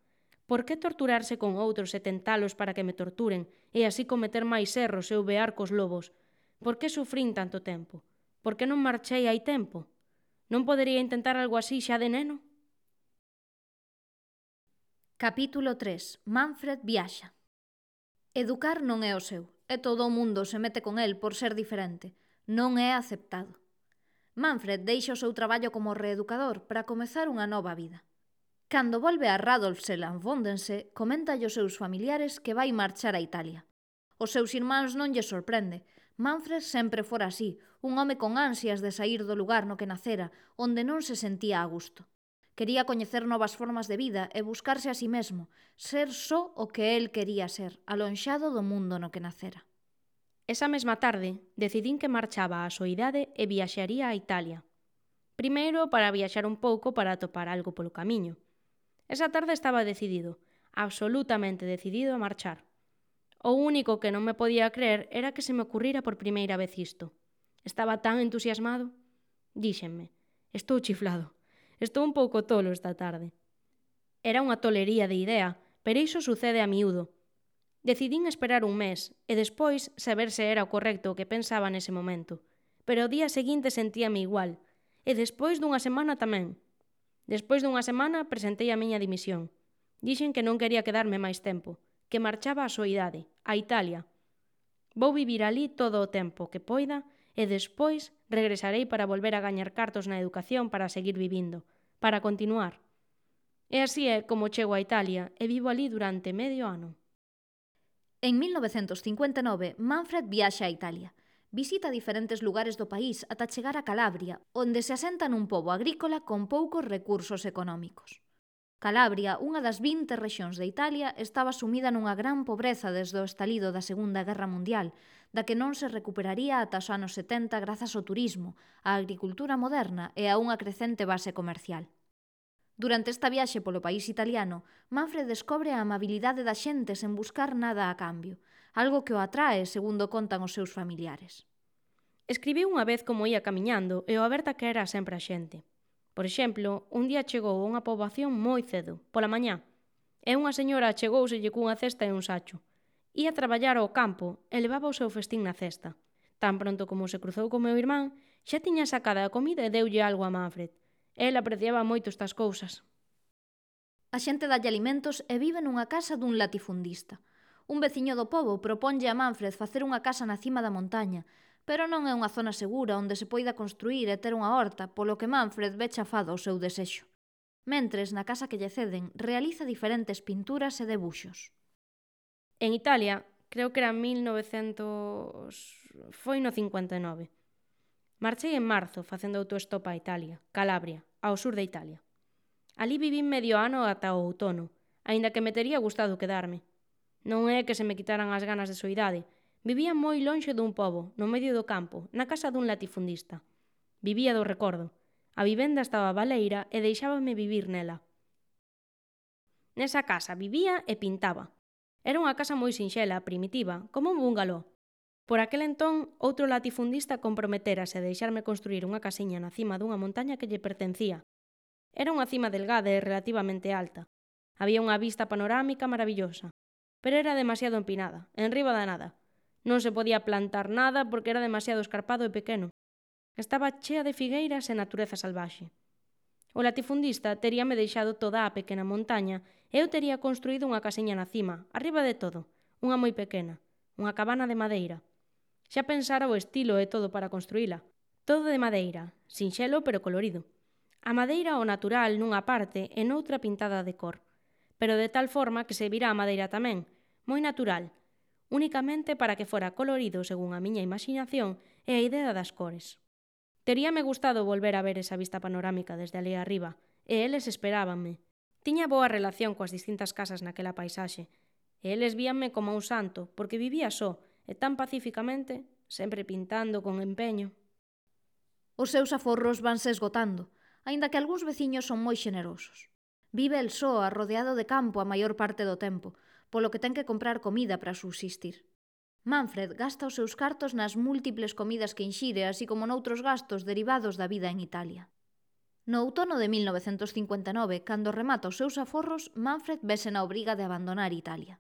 Speaker 2: Por que torturarse con outros e tentalos para que me torturen e así cometer máis erros e uvear cos lobos? Por que sufrín tanto tempo? Por que non marchei hai tempo? Non podería intentar algo así xa de neno?
Speaker 1: Capítulo 3. Manfred viaxa. Educar non é o seu, e todo o mundo se mete con el por ser diferente. Non é aceptado. Manfred deixa o seu traballo como reeducador para comezar unha nova vida. Cando volve a Radolfsland Vondense, comenta aos seus familiares que vai marchar a Italia. Os seus irmáns non lle sorprende, Manfred sempre fora así, un home con ansias de saír do lugar no que nacera, onde non se sentía a gusto. Quería coñecer novas formas de vida e buscarse a si mesmo, ser só o que el quería ser, alonxado do mundo no que nacera.
Speaker 2: Esa mesma tarde, decidín que marchaba á soidade e viaxaría a Italia. Primeiro, para viaxar un pouco para atopar algo polo camiño. Esa tarde estaba decidido, absolutamente decidido a marchar. O único que non me podía creer era que se me ocurrira por primeira vez isto. Estaba tan entusiasmado. Díxenme, estou chiflado. Estou un pouco tolo esta tarde. Era unha tolería de idea, pero iso sucede a miúdo. Decidín esperar un mes e despois saber se era o correcto o que pensaba nese momento. Pero o día seguinte sentíame igual. E despois dunha semana tamén. Despois dunha semana presentei a miña dimisión. Dixen que non quería quedarme máis tempo, que marchaba á soidade, a Italia. Vou vivir ali todo o tempo que poida e despois regresarei para volver a gañar cartos na educación para seguir vivindo, para continuar. E así é como chego a Italia e vivo ali durante medio ano.
Speaker 1: En 1959, Manfred viaxa a Italia. Visita diferentes lugares do país ata chegar a Calabria, onde se asenta nun pobo agrícola con poucos recursos económicos. Calabria, unha das 20 rexións de Italia, estaba sumida nunha gran pobreza desde o estalido da Segunda Guerra Mundial, da que non se recuperaría ata os anos 70 grazas ao turismo, á agricultura moderna e a unha crecente base comercial. Durante esta viaxe polo país italiano, Manfred descobre a amabilidade da xente sen buscar nada a cambio, algo que o atrae, segundo contan os seus familiares.
Speaker 2: Escribiu unha vez como ia camiñando e o aberta que era sempre a xente. Por exemplo, un día chegou a unha poboación moi cedo, pola mañá, e unha señora achegouselle cunha cesta e un sacho. Ía traballar ao campo e levaba o seu festín na cesta. Tan pronto como se cruzou co meu irmán, xa tiña sacada a comida e deulle algo a Manfred. El apreciaba moito estas cousas.
Speaker 1: A xente dalle alimentos e vive nunha casa dun latifundista. Un veciño do pobo proponlle a Manfred facer unha casa na cima da montaña, pero non é unha zona segura onde se poida construir e ter unha horta, polo que Manfred ve chafado o seu desexo. Mentres, na casa que lle ceden, realiza diferentes pinturas e debuxos.
Speaker 2: En Italia, creo que era 1900... foi no 59. Marchei en marzo facendo autostop a Italia, Calabria, ao sur de Italia. Alí vivín medio ano ata o outono, aínda que me tería gustado quedarme. Non é que se me quitaran as ganas de soidade. Vivía moi lonxe dun pobo, no medio do campo, na casa dun latifundista. Vivía do recordo. A vivenda estaba baleira e deixábame vivir nela. Nesa casa vivía e pintaba. Era unha casa moi sinxela, primitiva, como un bungalow. Por aquel entón, outro latifundista comprometérase a deixarme construir unha casiña na cima dunha montaña que lle pertencía. Era unha cima delgada e relativamente alta. Había unha vista panorámica maravillosa, pero era demasiado empinada, enriba da nada. Non se podía plantar nada porque era demasiado escarpado e pequeno. Estaba chea de figueiras e natureza salvaxe. O latifundista teríame deixado toda a pequena montaña e eu tería construído unha casiña na cima, arriba de todo, unha moi pequena, unha cabana de madeira. Xa pensara o estilo e todo para construíla. Todo de madeira, sinxelo pero colorido. A madeira o natural nunha parte e noutra pintada de cor, pero de tal forma que se vira a madeira tamén, moi natural, únicamente para que fora colorido según a miña imaginación e a idea das cores. Teríame gustado volver a ver esa vista panorámica desde ali arriba, e eles esperábanme. Tiña boa relación coas distintas casas naquela paisaxe, e eles víanme como un santo, porque vivía só, e tan pacíficamente, sempre pintando con empeño.
Speaker 1: Os seus aforros vanse esgotando, aínda que algúns veciños son moi xenerosos. Vive el só, rodeado de campo a maior parte do tempo, polo que ten que comprar comida para subsistir. Manfred gasta os seus cartos nas múltiples comidas que inxire, así como noutros gastos derivados da vida en Italia. No outono de 1959, cando remata os seus aforros, Manfred vese na obriga de abandonar Italia.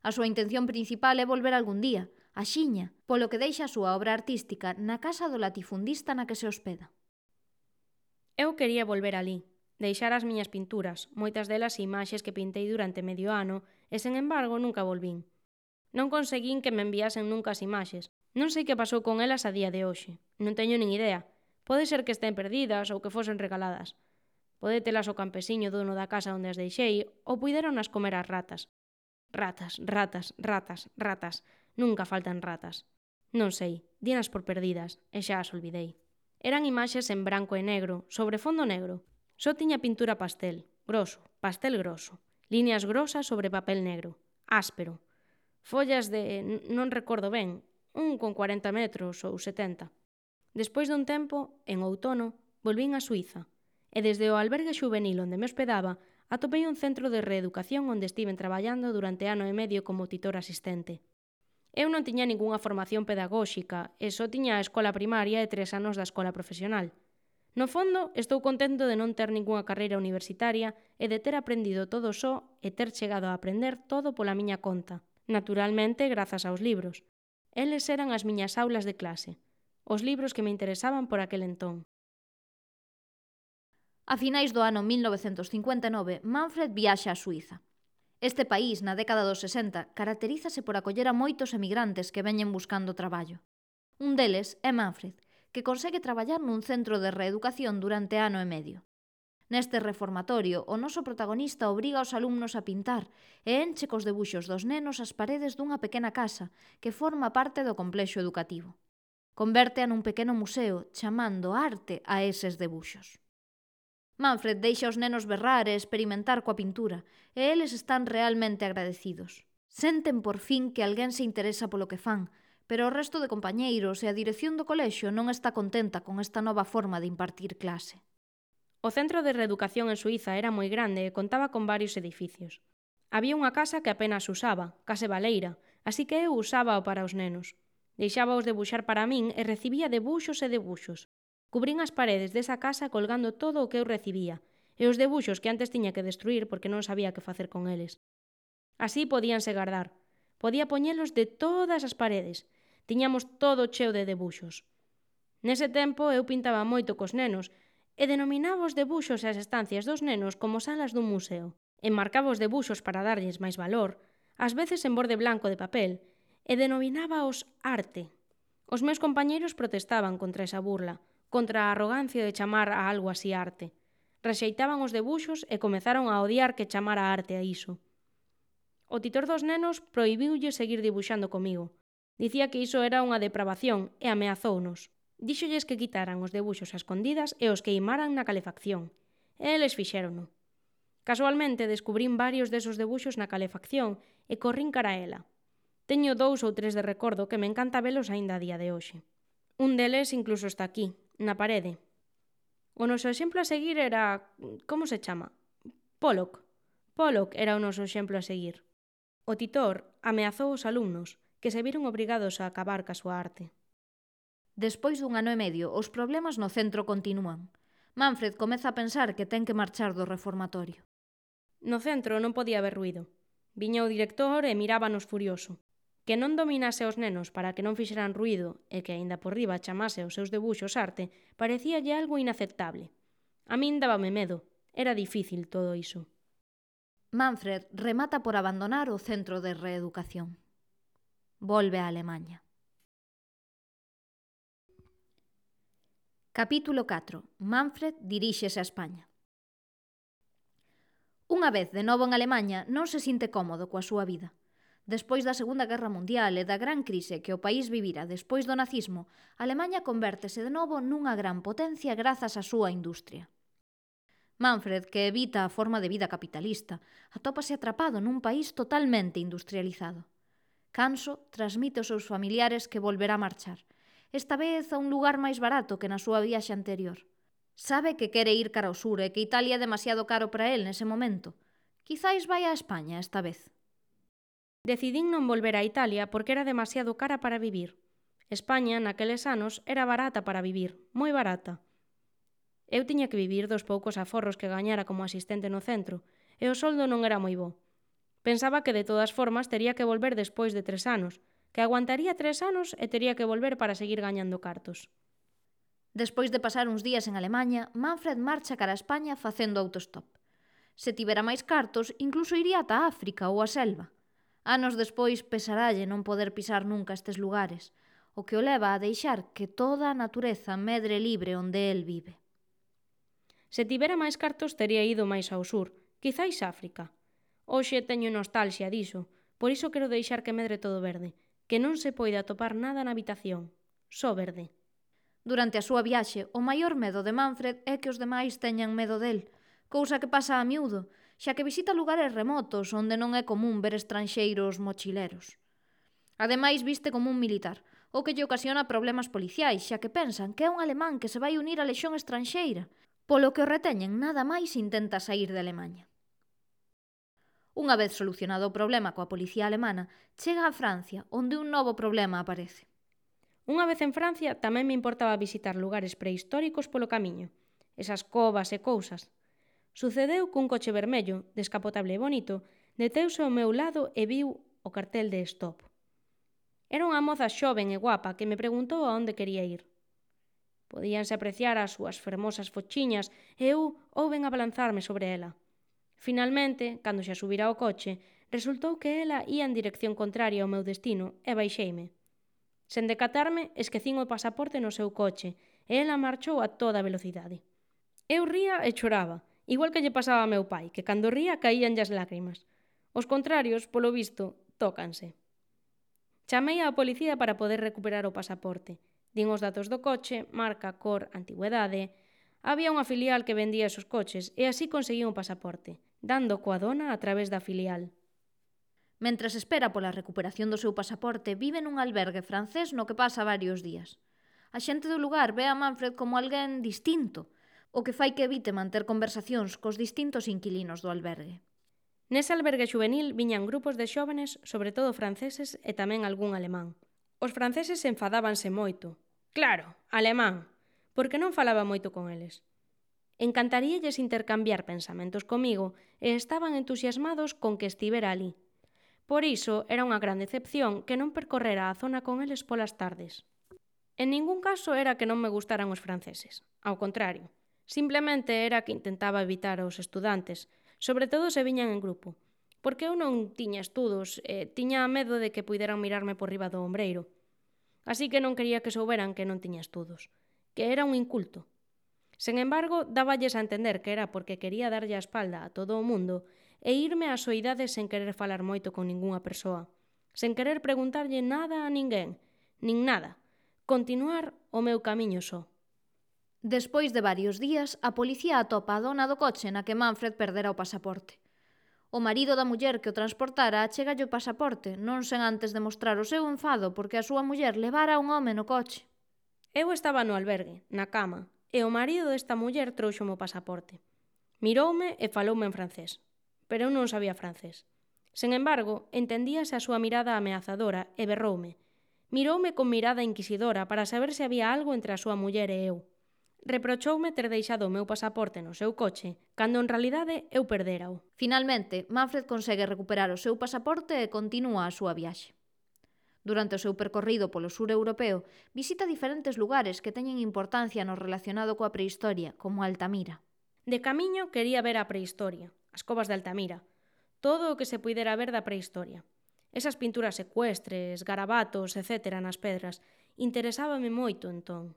Speaker 1: A súa intención principal é volver algún día, a Xiña, polo que deixa a súa obra artística na casa do latifundista na que se hospeda.
Speaker 2: Eu quería volver alí, deixar as miñas pinturas, moitas delas imaxes que pintei durante medio ano, e sen embargo nunca volvín. Non conseguín que me enviasen nunca as imaxes. Non sei que pasou con elas a día de hoxe. Non teño nin idea. Pode ser que estén perdidas ou que fosen regaladas. Pode telas o campesiño dono da casa onde as deixei ou puideronas comer as ratas. Ratas, ratas, ratas, ratas. Nunca faltan ratas. Non sei, dinas por perdidas, e xa as olvidei. Eran imaxes en branco e negro, sobre fondo negro. Só tiña pintura pastel, groso, pastel groso. Líneas grosas sobre papel negro, áspero. Follas de, non recordo ben, un con 40 metros ou 70. Despois dun tempo, en outono, volvín a Suíza, e desde o albergue xuvenil onde me hospedaba, atopei un centro de reeducación onde estiven traballando durante ano e medio como titor asistente. Eu non tiña ningunha formación pedagóxica e só tiña a escola primaria e 3 anos da escola profesional. No fondo, estou contento de non ter ningunha carreira universitaria e de ter aprendido todo só e ter chegado a aprender todo pola miña conta, naturalmente grazas aos libros. Eles eran as miñas aulas de clase, os libros que me interesaban por aquel entón.
Speaker 1: A finais do ano 1959, Manfred viaxa a Suíza. Este país, na década dos 60, caracterízase por acoller a moitos emigrantes que veñen buscando traballo. Un deles é Manfred, que consegue traballar nun centro de reeducación durante ano e medio. Neste reformatorio, o noso protagonista obriga aos alumnos a pintar e enche cos debuxos dos nenos as paredes dunha pequena casa que forma parte do complexo educativo. Convértea nun pequeno museo, chamando arte a eses debuxos. Manfred deixa os nenos berrar e experimentar coa pintura, e eles están realmente agradecidos. Senten por fin que alguén se interesa polo que fan, pero o resto de compañeiros e a dirección do colexio non está contenta con esta nova forma de impartir clase.
Speaker 2: O centro de reeducación en Suíza era moi grande e contaba con varios edificios. Había unha casa que apenas usaba, case baleira, así que eu usábao para os nenos. Deixábaos debuxar para min e recibía debuxos e debuxos. Cubrín as paredes desa casa colgando todo o que eu recibía, e os debuxos que antes tiña que destruir porque non sabía que facer con eles. Así podíanse guardar. Podía poñelos de todas as paredes. Tiñamos todo cheo de debuxos. Nese tempo eu pintaba moito cos nenos e denominaba os debuxos e as estancias dos nenos como salas dun museo. Enmarcaba os debuxos para darlles máis valor, ás veces en borde blanco de papel, e denominábaos arte. Os meus compañeiros protestaban contra esa burla, contra a arrogancia de chamar a algo así arte. Rexeitaban os debuxos e comezaron a odiar que chamara arte a iso. O titor dos nenos prohibiulle seguir dibuxando comigo. Dicía que iso era unha depravación e ameazounos. Díxolles que quitaran os debuxos a escondidas e os queimaran na calefacción. E eles fixérono. Casualmente descubrín varios desos debuxos na calefacción e corrín cara a ela. Teño 2 ou 3 de recordo que me encanta velos aínda a día de hoxe. Un deles incluso está aquí, na parede. O noso exemplo a seguir era... como se chama? Pollock. Pollock era o noso exemplo a seguir. O titor ameazou os alumnos, que se viron obrigados a acabar ca súa arte.
Speaker 1: Despois dun ano e medio, os problemas no centro continúan. Manfred comeza a pensar que ten que marchar do reformatorio.
Speaker 2: No centro non podía haber ruído. Viña o director e mirábanos furioso. Que non dominase os nenos para que non fixeran ruído e que aínda por riba chamase os seus debuxos arte parecíalle algo inaceptable. A min dábame medo. Era difícil todo iso.
Speaker 1: Manfred remata por abandonar o centro de reeducación. Volve a Alemaña. Capítulo 4. Manfred diríxese a España. Unha vez de novo en Alemaña, non se sinte cómodo coa súa vida. Despois da Segunda Guerra Mundial e da gran crise que o país vivira despois do nazismo, Alemaña convértese de novo nunha gran potencia grazas á súa industria. Manfred, que evita a forma de vida capitalista, atópase atrapado nun país totalmente industrializado. Canso transmite aos seus familiares que volverá a marchar, esta vez a un lugar máis barato que na súa viaxe anterior. Sabe que quere ir cara ao sur e que Italia é demasiado caro para el nese momento. Quizáis vai a España esta vez.
Speaker 2: Decidín non volver a Italia porque era demasiado cara para vivir. España, naqueles anos, era barata para vivir, moi barata. Eu tiña que vivir dos poucos aforros que gañara como asistente no centro, e o soldo non era moi bo. Pensaba que de todas formas tería que volver despois de 3 anos, que aguantaría 3 anos e tería que volver para seguir gañando cartos.
Speaker 1: Despois de pasar uns días en Alemaña, Manfred marcha cara a España facendo autostop. Se tivera máis cartos, incluso iría ata África ou a selva. Anos despois pesaralle non poder pisar nunca estes lugares, o que o leva a deixar que toda a natureza medre libre onde el vive.
Speaker 2: Se tivera máis cartos tería ido máis ao sur, quizáis África. Hoxe teño nostalxia diso, por iso quero deixar que medre todo verde. que non se poida atopar nada na habitación, só verde.
Speaker 1: Durante a súa viaxe, o maior medo de Manfred é que os demais teñan medo del, cousa que pasa a miúdo, xa que visita lugares remotos onde non é común ver estranxeiros mochileros. Ademais, viste como un militar, o que lle ocasiona problemas policiais, xa que pensan que é un alemán que se vai unir á lexión estranxeira, polo que o reteñen nada máis intenta saír de Alemaña. Unha vez solucionado o problema coa policía alemana, chega a Francia, onde un novo problema aparece.
Speaker 2: Unha vez en Francia tamén me importaba visitar lugares prehistóricos polo camiño, esas covas e cousas. Sucedeu cun coche vermello, descapotable e bonito, deteuse ao meu lado e viu o cartel de stop. Era unha moza xoven e guapa que me preguntou a onde quería ir. Podíanse apreciar as súas fermosas fochiñas e eu houben abalanzarme sobre ela. Finalmente, cando xa subira ao coche, resultou que ela ía en dirección contraria ao meu destino e baixeime. Sen decatarme, esquecín o pasaporte no seu coche e ela marchou a toda velocidade. Eu ría e choraba, igual que lle pasaba a meu pai, que cando ría caíanlle as lágrimas. Os contrarios, polo visto, tócanse. Chamei á policía para poder recuperar o pasaporte. Din os datos do coche, marca, cor, antigüedade. Había unha filial que vendía esos coches e así conseguí un pasaporte, dando coa dona a través da filial.
Speaker 1: Mentres espera pola recuperación do seu pasaporte, vive nun albergue francés no que pasa varios días. A xente do lugar ve a Manfred como alguén distinto, o que fai que evite manter conversacións cos distintos inquilinos do albergue.
Speaker 2: Nese albergue xuvenil viñan grupos de xóvenes, sobre todo franceses e tamén algún alemán. Os franceses enfadábanse moito. Claro, alemán, porque non falaba moito con eles. Encantaríalles intercambiar pensamentos comigo e estaban entusiasmados con que estivera ali. Por iso, era unha gran decepción que non percorrera a zona con eles polas tardes. En ningún caso era que non me gustaran os franceses. Ao contrario, simplemente era que intentaba evitar aos estudantes, sobre todo se viñan en grupo, porque eu non tiña estudos e tiña medo de que puideran mirarme por riba do ombreiro. Así que non quería que souberan que non tiña estudos, que era un inculto. Sen embargo, dáballes a entender que era porque quería darlle a espalda a todo o mundo e irme ás soidades sen querer falar moito con ningunha persoa, sen querer preguntarlle nada a ninguén, nin nada, continuar o meu camiño só.
Speaker 1: Despois de varios días, a policía atopa a dona do coche na que Manfred perdera o pasaporte. O marido da muller que o transportara achegalle o pasaporte, non sen antes demostrar o seu enfado porque a súa muller levara un home no coche.
Speaker 2: Eu estaba no albergue, na cama, e o marido desta muller trouxome o pasaporte. Miroume e faloume en francés, pero eu non sabía francés. Sen embargo, entendíase a súa mirada ameazadora e berroume. Miroume con mirada inquisidora para saber se había algo entre a súa muller e eu. Reprochoume ter deixado o meu pasaporte no seu coche, cando en realidade eu perdérao.
Speaker 1: Finalmente, Manfred consegue recuperar o seu pasaporte e continúa a súa viaxe. Durante o seu percorrido polo sur europeo, visita diferentes lugares que teñen importancia no relacionado coa prehistoria, como Altamira.
Speaker 2: De camiño quería ver a prehistoria, as covas de Altamira, todo o que se puidera ver da prehistoria. Esas pinturas ecuestres, garabatos, etc. nas pedras, interesábame moito entón.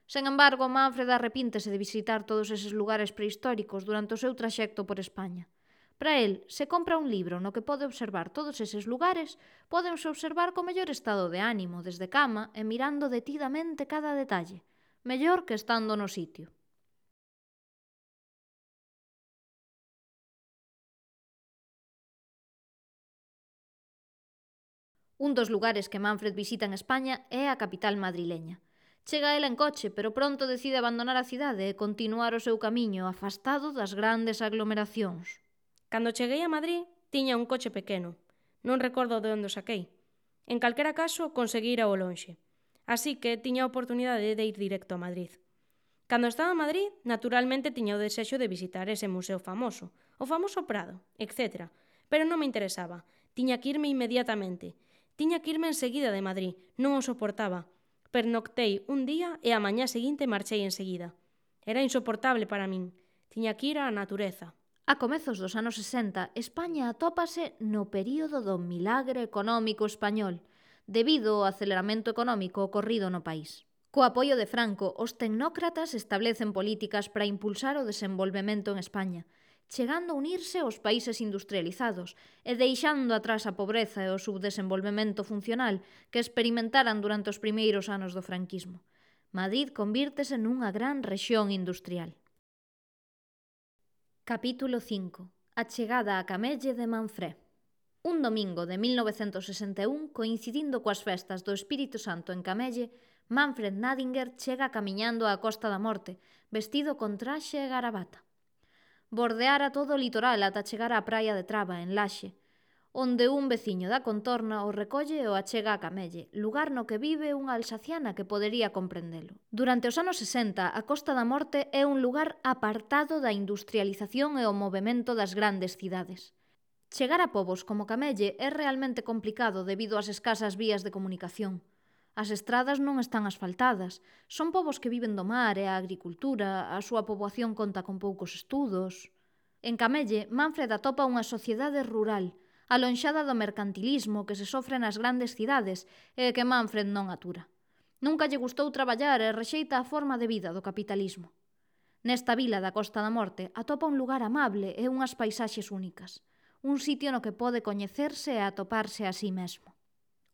Speaker 1: Sen embargo, Manfred arrepíntese de visitar todos eses lugares prehistóricos durante o seu traxecto por España. Para el, se compra un libro no que pode observar todos eses lugares, pódense observar co mellor estado de ánimo, desde cama e mirando detidamente cada detalle, mellor que estando no sitio. Un dos lugares que Manfred visita en España é a capital madrileña. Chega ela en coche, pero pronto decide abandonar a cidade e continuar o seu camiño afastado das grandes aglomeracións.
Speaker 2: Cando cheguei a Madrid, tiña un coche pequeno. Non recordo de onde o saquei. En calquera caso, conseguí ir ao lonxe. Así que tiña a oportunidade de ir directo a Madrid. Cando estaba a Madrid, naturalmente tiña o desexo de visitar ese museo famoso, o famoso Prado, etc. Pero non me interesaba. Tiña que irme inmediatamente. Tiña que irme enseguida de Madrid. Non o soportaba. Pernoctei un día e a mañá seguinte marchei enseguida. Era insoportable para min. Tiña que ir á natureza.
Speaker 1: A comezos dos anos 60, España atópase no período do milagre económico español, debido ao aceleramento económico ocorrido no país. Co apoio de Franco, os tecnócratas establecen políticas para impulsar o desenvolvemento en España, chegando a unirse aos países industrializados e deixando atrás a pobreza e o subdesenvolvemento funcional que experimentaran durante os primeiros anos do franquismo. Madrid convírtese nunha gran rexión industrial. Capítulo 5. A chegada a Camelle de Manfré. Un domingo de 1961, coincidindo coas festas do Espírito Santo en Camelle, Manfred Nadinger chega camiñando á Costa da Morte, vestido con traxe e garabata. Bordeara todo o litoral ata chegar á praia de Traba, en Laxe, onde un veciño da contorna o recolle e o achega a Camelle, lugar no que vive unha alsaciana que podería comprendelo. Durante os anos 60, a Costa da Morte é un lugar apartado da industrialización e o movemento das grandes cidades. Chegar a pobos como Camelle é realmente complicado debido ás escasas vías de comunicación. As estradas non están asfaltadas, son pobos que viven do mar e a agricultura, a súa poboación conta con poucos estudos. En Camelle, Manfred atopa unha sociedade rural, alonxada do mercantilismo que se sofre nas grandes cidades e que Manfred non atura. Nunca lle gustou traballar e rexeita a forma de vida do capitalismo. Nesta vila da Costa da Morte atopa un lugar amable e unhas paisaxes únicas, un sitio no que pode coñecerse e atoparse a sí mesmo.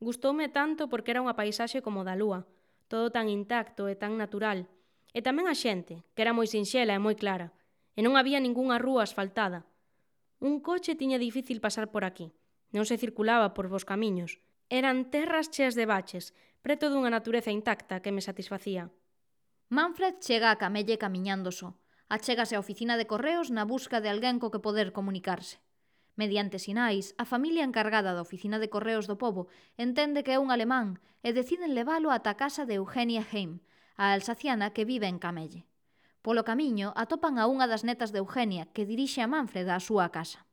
Speaker 2: Gustoume tanto porque era unha paisaxe como da lúa, todo tan intacto e tan natural, e tamén a xente, que era moi sinxela e moi clara, e non había ningunha rúa asfaltada. Un coche tiña difícil pasar por aquí, non se circulaba por vos camiños, eran terras cheas de baches, preto dunha natureza intacta que me satisfacía.
Speaker 1: Manfred chega a Camelle camiñando só, achégase á oficina de correos na busca de alguén co que poder comunicarse. Mediante sinais, a familia encargada da oficina de correos do pobo entende que é un alemán e deciden leválo ata a casa de Eugenia Heim, a alsaciana que vive en Camelle. Polo camiño atopan a unha das netas de Eugenia que dirixe a Manfred á súa casa.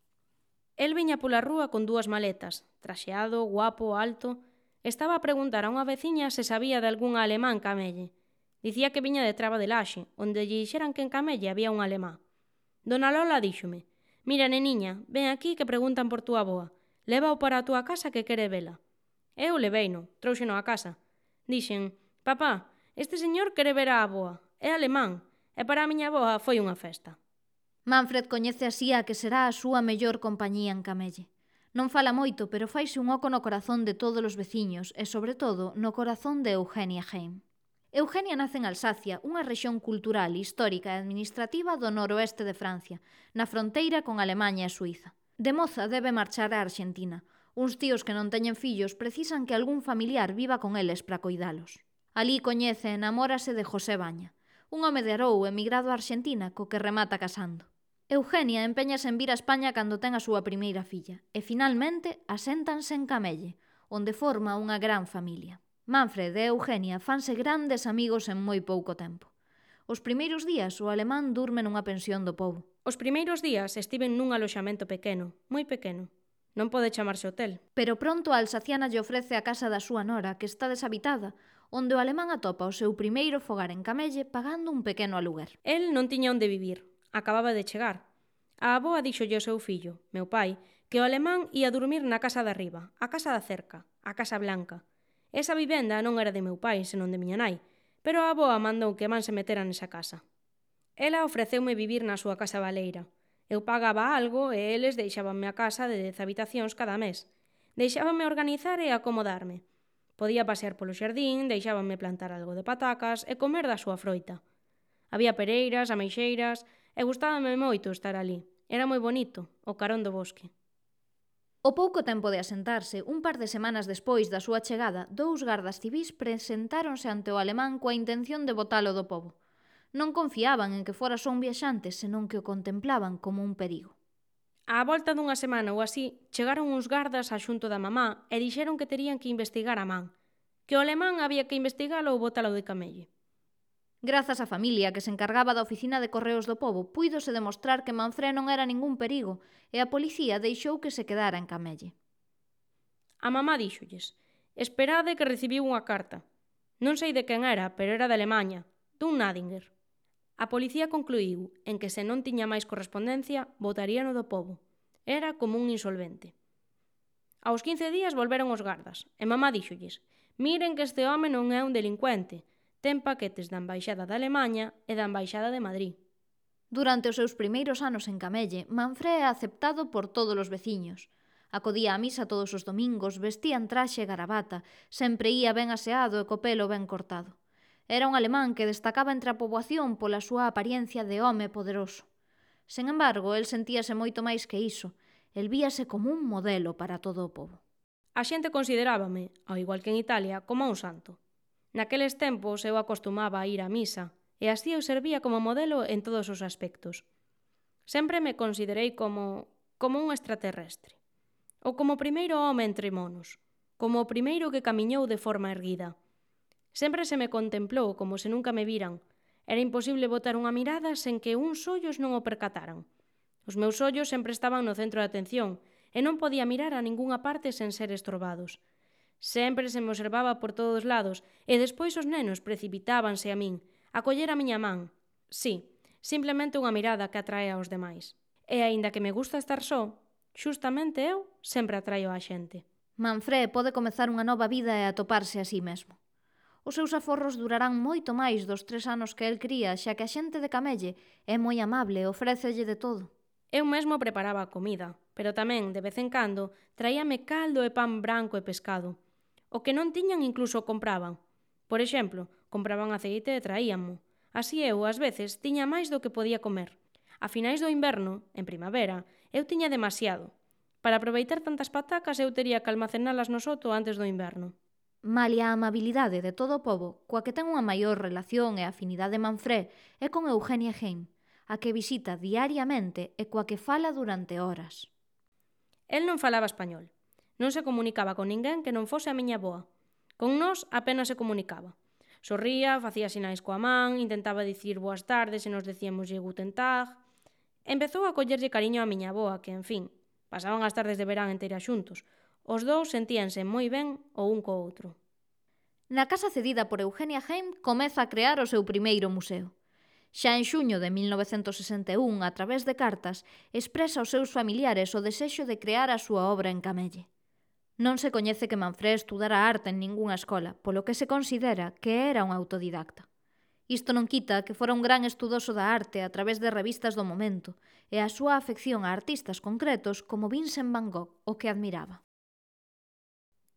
Speaker 2: El viña pola rúa con 2 maletas, traxeado, guapo, alto. Estaba a preguntar a unha veciña se sabía de algún alemán en Camelle. Dicía que viña de Traba de Laxe, onde lle dixeran que en Camelle había un alemán. Dona Lola díxome: «Mira, neniña, ven aquí que preguntan por túa avoa. Lévao para a túa casa que quere vela». Eu leveino, trouxeno a casa. Dixen: «Papá, este señor quere ver a avoa. É alemán, e para a miña avoa foi unha festa».
Speaker 1: Manfred coñece así a que será a súa mellor compañía en Camelle. Non fala moito, pero faise un oco no corazón de todos os veciños e, sobre todo, no corazón de Eugenia Heim. Eugenia nace en Alsacia, unha rexión cultural, histórica e administrativa do noroeste de Francia, na fronteira con Alemaña e Suíza. De moza debe marchar á Arxentina. Uns tíos que non teñen fillos precisan que algún familiar viva con eles para coidalos. Alí coñece e namórase de José Baña, un home de Arou emigrado a Arxentina co que remata casando. Eugenia empeñase en vir a España cando ten a súa primeira filla e finalmente aséntanse en Camelle, onde forma unha gran familia. Manfred e Eugenia fanse grandes amigos en moi pouco tempo. Os primeiros días o alemán durme nunha pensión do pobo.
Speaker 2: Os primeiros días estiven nun aloxamento pequeno, moi pequeno. Non pode chamarse hotel.
Speaker 1: Pero pronto a alsaciana lle ofrece a casa da súa nora, que está deshabitada, onde o alemán atopa o seu primeiro fogar en Camelle pagando un pequeno aluguer.
Speaker 2: El non tiña onde vivir, acababa de chegar. A avoa díxolle ao seu fillo, meu pai, que o alemán ia dormir na casa de arriba, a casa da cerca, a casa blanca. Esa vivenda non era de meu pai, senón de miña nai, pero a avoa mandou que man se metera nesa casa. Ela ofreceume vivir na súa casa baleira. Eu pagaba algo e eles deixábanme a casa de 10 habitacións cada mes. Deixábanme organizar e acomodarme. Podía pasear polo xardín, deixábanme plantar algo de patacas e comer da súa froita. Había pereiras, ameixeiras e gustábame moito estar ali. Era moi bonito, o carón do bosque.
Speaker 1: O pouco tempo de asentarse, un par de semanas despois da súa chegada, 2 gardas civís presentáronse ante o alemán coa intención de botalo do pobo. Non confiaban en que fora só un viaxante, senón que o contemplaban como un perigo.
Speaker 2: Á volta dunha semana ou así, chegaron uns gardas a xunto da mamá e dixeron que terían que investigar a man, que o alemán había que investigalo ou botalo de Camelle.
Speaker 1: Grazas á familia que se encargaba da oficina de correos do pobo, puídose demostrar que Manfré non era ningún perigo e a policía deixou que se quedara en Camelle.
Speaker 2: A mamá díxolles: «Esperade que recibiu unha carta. Non sei de quen era, pero era de Alemanha, dun Nadinger». A policía concluíu en que se non tiña máis correspondencia, botaríano do pobo. Era como un insolvente. Aos 15 días volveron os gardas, e mamá díxolles: «Miren que este home non é un delincuente, ten paquetes da Embaixada de Alemaña e da Embaixada de Madrid».
Speaker 1: Durante os seus primeiros anos en Camelle, Manfré é aceptado por todos os veciños. Acodía a misa todos os domingos, vestía en traxe e garabata, sempre ía ben aseado e co pelo ben cortado. Era un alemán que destacaba entre a poboación pola súa apariencia de home poderoso. Sen embargo, el sentíase moito máis que iso. El víase como un modelo para todo o pobo.
Speaker 2: A xente considerábame, ao igual que en Italia, como un santo. Naqueles tempos eu acostumaba a ir á misa, e así eu servía como modelo en todos os aspectos. Sempre me considerei como un extraterrestre. Ou como o primeiro home entre monos, como o primeiro que camiñou de forma erguida. Sempre se me contemplou como se nunca me viran. Era imposible botar unha mirada sen que uns ollos non o percataran. Os meus ollos sempre estaban no centro de atención e non podía mirar a ningunha parte sen ser estorbados. Sempre se me observaba por todos lados e despois os nenos precipitábanse a min, a coller a miña man. Sí, simplemente unha mirada que atrae aos demais. E aínda que me gusta estar só, xustamente eu sempre atraio á xente.
Speaker 1: Manfré pode comezar unha nova vida e atoparse a sí mesmo. Os seus aforros durarán moito máis dos 3 anos que el cría, xa que a xente de Camelle é moi amable e ofrécelle de todo.
Speaker 2: Eu mesmo preparaba a comida, pero tamén, de vez en cando, traíame caldo e pan branco e pescado. O que non tiñan incluso compraban. Por exemplo, compraban aceite e traíanmo. Así eu, ás veces, tiña máis do que podía comer. A finais do inverno, en primavera, eu tiña demasiado. Para aproveitar tantas patacas eu tería que almacenalas no soto antes do inverno.
Speaker 1: Malia a amabilidade de todo o pobo, coa que ten unha maior relación e afinidade Manfré é con Eugenia Heim, a que visita diariamente e coa que fala durante horas.
Speaker 2: El non falaba español. Non se comunicaba con ninguén que non fose a miña avoa. Con nós apenas se comunicaba. Sorría, facía sinais coa man, intentaba dicir boas tardes e nos decíamoslle guten tag. Empezou a collerlle cariño a miña avoa, que, en fin, pasaban as tardes de verán enteiras xuntos. Os dous sentíanse moi ben o un co outro.
Speaker 1: Na casa cedida por Eugenia Heim comeza a crear o seu primeiro museo. Xa en xuño de 1961, a través de cartas, expresa aos seus familiares o desexo de crear a súa obra en Camelle. Non se coñece que Manfré estudara arte en ningunha escola, polo que se considera que era un autodidacta. Isto non quita que fora un gran estudoso da arte a través de revistas do momento e a súa afección a artistas concretos como Vincent van Gogh, o que admiraba.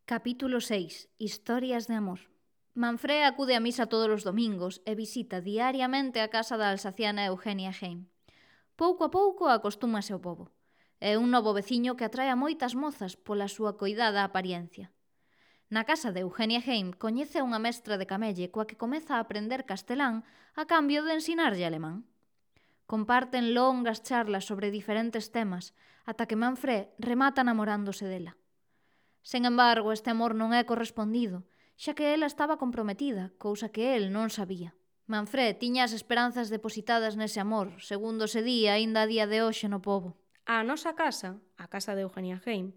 Speaker 1: Capítulo 6. Historias de amor. Manfré acude a misa todos os domingos e visita diariamente a casa da alsaciana Eugenia Heim. Pouco a pouco acostúmase ao pobo. É un novo veciño que atrae a moitas mozas pola súa coidada apariencia. Na casa de Eugenia Heim coñece a unha mestra de Camelle coa que comeza a aprender castelán a cambio de ensinarlle alemán. Comparten longas charlas sobre diferentes temas ata que Manfré remata namorándose dela. Sen embargo, este amor non é correspondido, xa que ela estaba comprometida, cousa que el non sabía. Manfré tiña as esperanzas depositadas nese amor, segundo se di aínda a día de hoxe no pobo.
Speaker 2: A nosa casa, a casa de Eugenia Heim,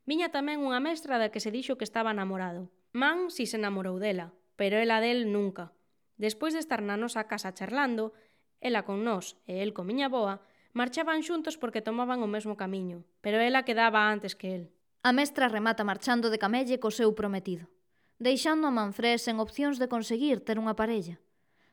Speaker 2: viña tamén unha mestra da que se dixo que estaba namorado. Man si se namorou dela, pero ela del nunca. Despois de estar na nosa casa charlando, ela con nós e el con miña avoa, marchaban xuntos porque tomaban o mesmo camiño, pero ela quedaba antes que el.
Speaker 1: A mestra remata marchando de Camelle co seu prometido, deixando a Manfré sen opcións de conseguir ter unha parella.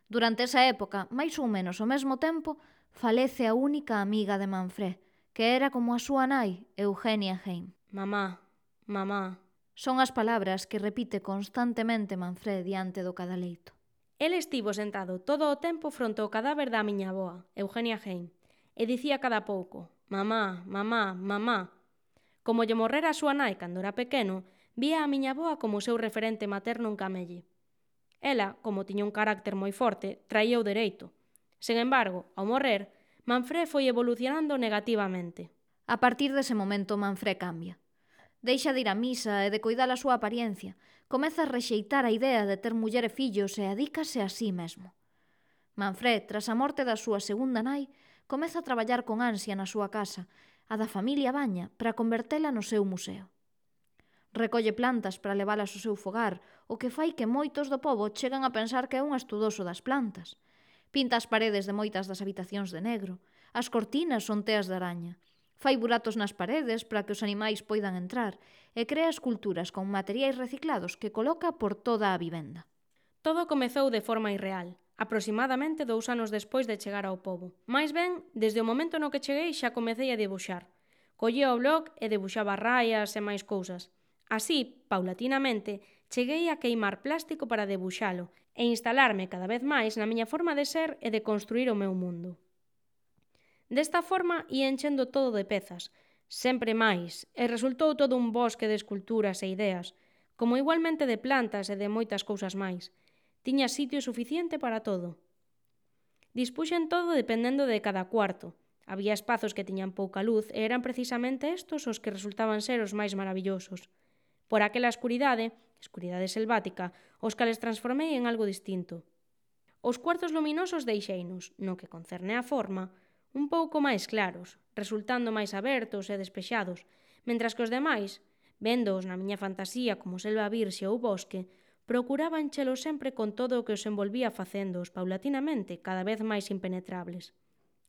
Speaker 1: Durante esa época, máis ou menos ao mesmo tempo, falece a única amiga de Manfré, que era como a súa nai, Eugenia Heim.
Speaker 2: Mamá, mamá.
Speaker 1: Son as palabras que repite constantemente Manfré diante do cadaleito.
Speaker 2: El estivo sentado todo o tempo fronte ao cadáver da miña avoa, Eugenia Heim, e dicía cada pouco, mamá, mamá, mamá. Como lle morrera a súa nai cando era pequeno, vía a miña avoa como o seu referente materno en Camelle. Ela, como tiña un carácter moi forte, traía o dereito. Sen embargo, ao morrer, Manfré foi evolucionando negativamente.
Speaker 1: A partir dese momento, Manfré cambia. Deixa de ir á misa e de coidar a súa apariencia. Comeza a rexeitar a idea de ter muller e fillos e adícase a sí mesmo. Manfré, tras a morte da súa segunda nai, comeza a traballar con ansia na súa casa, a da familia Baña, para convertela no seu museo. Recolle plantas para levalas ao seu fogar, o que fai que moitos do pobo chegan a pensar que é un estudoso das plantas. Pinta as paredes de moitas das habitacións de negro, as cortinas son teas de araña, fai buratos nas paredes para que os animais poidan entrar e crea esculturas con materiais reciclados que coloca por toda a vivenda.
Speaker 2: Todo comezou de forma irreal, aproximadamente 2 anos despois de chegar ao pobo. Mais ben, desde o momento no que cheguei xa comecei a debuxar. Collía o blog e debuxaba raias e máis cousas. Así, paulatinamente, cheguei a queimar plástico para debuxalo e instalarme cada vez máis na miña forma de ser e de construir o meu mundo. Desta forma ia enchendo todo de pezas, sempre máis, e resultou todo un bosque de esculturas e ideas, como igualmente de plantas e de moitas cousas máis. Tiña sitio suficiente para todo. Dispuxen todo dependendo de cada cuarto. Había espazos que tiñan pouca luz e eran precisamente estos os que resultaban ser os máis maravillosos. Por aquela escuridade selvática, os cales transformei en algo distinto. Os cuartos luminosos deixeinos, no que concerne á forma, un pouco máis claros, resultando máis abertos e despexados, mentras que os demais, véndoos na miña fantasía como selva virxe ou bosque, procuraba enchelo sempre con todo o que os envolvía facéndoos paulatinamente cada vez máis impenetrables.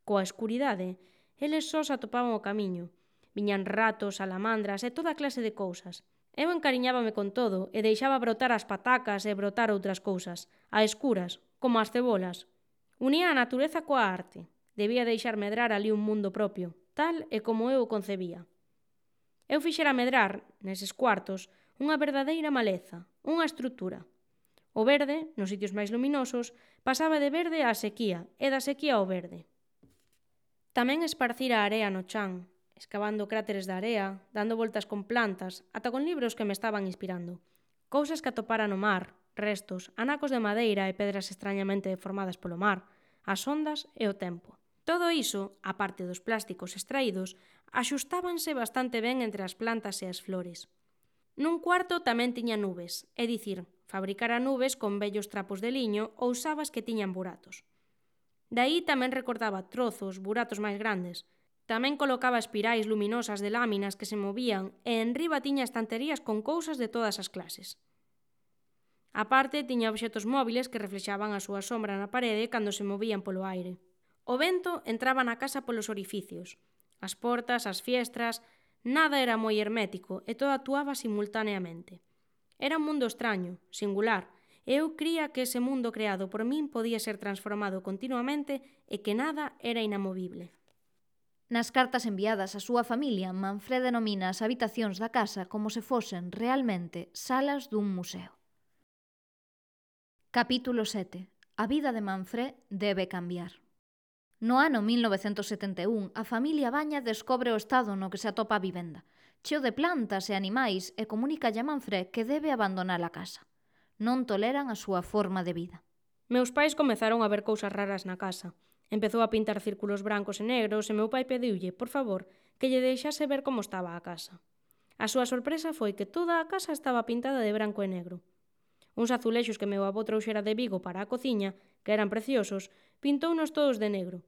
Speaker 2: Coa escuridade, eles sós atopaban o camiño. Viñan ratos, salamandras e toda clase de cousas. Eu encariñábame con todo e deixaba brotar as patacas e brotar outras cousas, a escuras, como as cebolas. Unía a natureza coa arte. Debía deixar medrar ali un mundo propio, tal e como eu o concebía. Eu fixera medrar, neses cuartos, unha verdadeira maleza, unha estrutura. O verde, nos sitios máis luminosos, pasaba de verde á sequía e da sequía ao verde. Tamén esparcira a area no chan, escavando cráteres de area, dando voltas con plantas, ata con libros que me estaban inspirando. Cousas que atopara no mar, restos, anacos de madeira e pedras extrañamente deformadas polo mar, as ondas e o tempo. Todo iso, a parte dos plásticos extraídos, axustábanse bastante ben entre as plantas e as flores. Nun cuarto tamén tiña nubes, é dicir, fabricara nubes con vellos trapos de liño ou sabas que tiñan buratos. Daí tamén recortaba trozos, buratos máis grandes. Tamén colocaba espirais luminosas de láminas que se movían e enriba tiña estanterías con cousas de todas as clases. A parte tiña obxetos móviles que reflexaban a súa sombra na parede cando se movían polo aire. O vento entraba na casa polos orificios. As portas, as fiestras, nada era moi hermético e todo actuaba simultaneamente. Era un mundo extraño, singular, e eu cría que ese mundo creado por min podía ser transformado continuamente e que nada era inamovible.
Speaker 1: Nas cartas enviadas á súa familia, Manfred denomina as habitacións da casa como se fosen realmente salas dun museo. Capítulo 7. A vida de Manfred debe cambiar. No ano 1971, a familia Baña descobre o estado no que se atopa a vivenda, cheo de plantas e animais, e comunícalle a Manfred que debe abandonar a casa. Non toleran a súa forma de vida.
Speaker 2: Meus pais comezaron a ver cousas raras na casa. Empezou a pintar círculos brancos e negros e meu pai pediulle, por favor, que lle deixase ver como estaba a casa. A súa sorpresa foi que toda a casa estaba pintada de branco e negro. Uns azulexos que meu avó trouxera de Vigo para a cociña, que eran preciosos, pintounos todos de negro.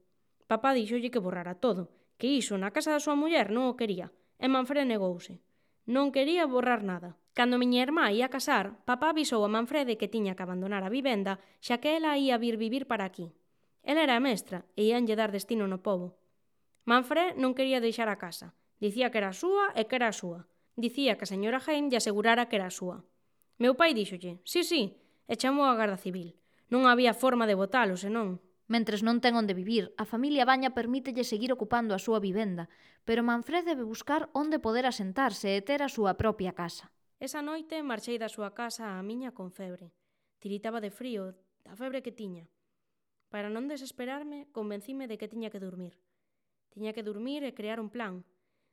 Speaker 2: Papá díxolle que borrara todo, que iso na casa da súa muller non o quería, e Manfred negouse. Non quería borrar nada. Cando miña irmá ia casar, papá avisou a Manfrede que tiña que abandonar a vivenda, xa que ela ia vir vivir para aquí. Ela era mestra e íanlle dar destino no pobo. Manfred non quería deixar a casa. Dicía que era súa e que era súa. Dicía que a señora Heim lle asegurara que era súa. Meu pai díxolle, sí, e chamou a Garda Civil. Non había forma de botalo, senón.
Speaker 1: Mentres non ten onde vivir, a familia Baña permítelle seguir ocupando a súa vivenda, pero Manfred debe buscar onde poder asentarse e ter a súa propia casa.
Speaker 2: Esa noite marchei da súa casa á miña con febre. Tiritaba de frío, da febre que tiña. Para non desesperarme, convencime de que tiña que dormir. Tiña que dormir e crear un plan.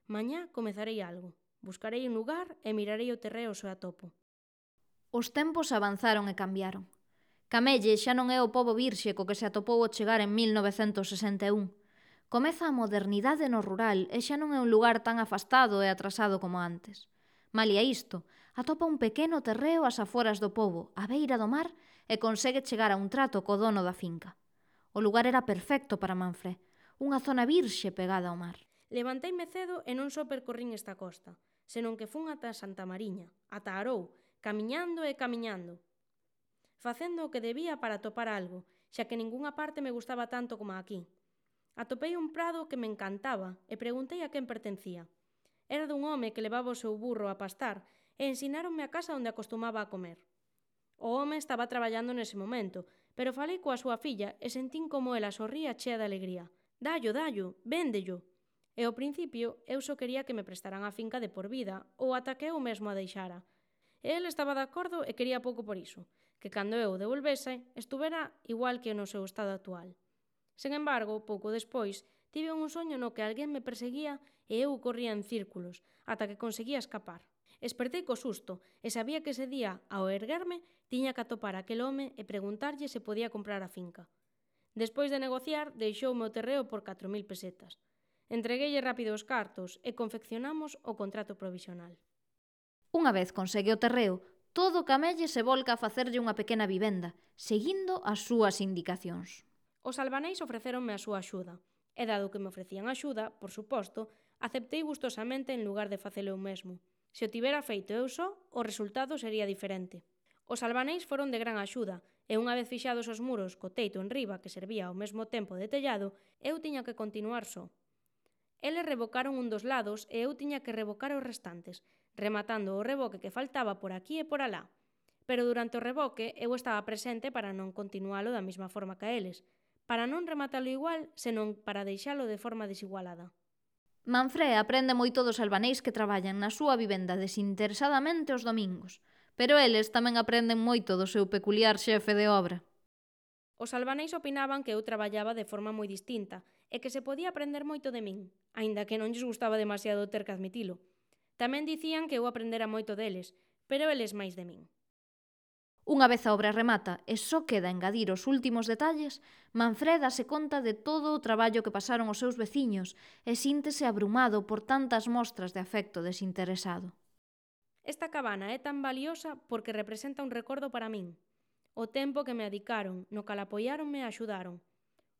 Speaker 2: Mañá comezarei algo. Buscarei un lugar e mirarei o terreo se o atopo.
Speaker 1: Os tempos avanzaron e cambiaron. Camelle xa non é o pobo virxe co que se atopou ao chegar en 1961. Comeza a modernidade no rural e xa non é un lugar tan afastado e atrasado como antes. Malia isto, atopa un pequeno terreo ás aforas do pobo, á beira do mar, e consegue chegar a un trato co dono da finca. O lugar era perfecto para Manfred, unha zona virxe pegada ao mar.
Speaker 2: Levanteime cedo e non só percorrín esta costa, senón que fun ata Santa Mariña, ata Arou, camiñando e camiñando, facendo o que debía para atopar algo, xa que ningunha parte me gustaba tanto como aquí. Atopei un prado que me encantaba e preguntei a quen pertencía. Era dun home que levaba o seu burro a pastar e ensináronme a casa onde acostumaba a comer. O home estaba traballando nese momento, pero falei coa súa filla e sentín como ela sorría chea de alegría. Dallo, dallo, véndello. E ao principio eu só quería que me prestaran a finca de por vida ou ata que eu mesmo a deixara. E el estaba de acordo e quería pouco por iso, que cando eu o devolvese estuvera igual que no seu estado actual. Sen embargo, pouco despois, tive un soño no que alguén me perseguía e eu corría en círculos, ata que conseguía escapar. Espertei co susto e sabía que ese día, ao erguerme, tiña que atopar aquel home e preguntarlle se podía comprar a finca. Despois de negociar, deixoume o terreo por 4.000 pesetas. Entregueille rápido os cartos e confeccionamos o contrato provisional.
Speaker 1: Unha vez consegue o terreo, todo o camelle se volca a facerlle unha pequena vivenda, seguindo as súas indicacións.
Speaker 2: Os albaneis ofrecéronme a súa axuda, e dado que me ofrecían axuda, por suposto, aceptei gustosamente en lugar de facelo eu mesmo. Se o tivera feito eu só, o resultado sería diferente. Os albaneis foron de gran axuda, e unha vez fixados os muros co teito en riba que servía ao mesmo tempo de tellado, eu tiña que continuar só. Eles revocaron un dos lados e eu tiña que revocar os restantes, rematando o reboque que faltaba por aquí e por alá. Pero durante o reboque eu estaba presente para non continualo da mesma forma que eles, para non rematalo igual, senón para deixalo de forma desigualada.
Speaker 1: Manfré aprende moito dos albaneis que traballan na súa vivenda desinteresadamente os domingos, pero eles tamén aprenden moito do seu peculiar xefe de obra.
Speaker 2: Os albaneis opinaban que eu traballaba de forma moi distinta e que se podía aprender moito de min, aínda que non lles gustaba demasiado ter que admitilo. Tamén dicían que eu aprendera moito deles, pero eles máis de min.
Speaker 1: Unha vez a obra remata e só queda engadir os últimos detalles, Manfred dase conta de todo o traballo que pasaron os seus veciños e síntese abrumado por tantas mostras de afecto desinteresado.
Speaker 2: Esta cabana é tan valiosa porque representa un recordo para min. O tempo que me adicaron, no cal apoiáronme e axudaron.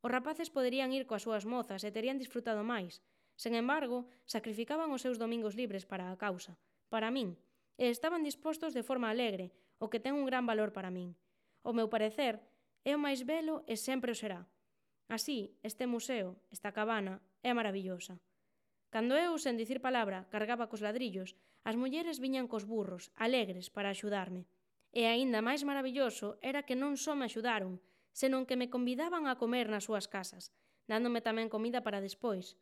Speaker 2: Os rapaces poderían ir coas súas mozas e terían disfrutado máis. Sen embargo, sacrificaban os seus domingos libres para a causa, para min, e estaban dispostos de forma alegre, o que ten un gran valor para min. Ao meu parecer, é o máis belo e sempre o será. Así, este museo, esta cabana, é maravillosa. Cando eu, sen dicir palabra, cargaba cos ladrillos, as mulleres viñan cos burros, alegres, para axudarme. E aínda máis maravilloso era que non só me axudaron, senón que me convidaban a comer nas súas casas, dándome tamén comida para despois.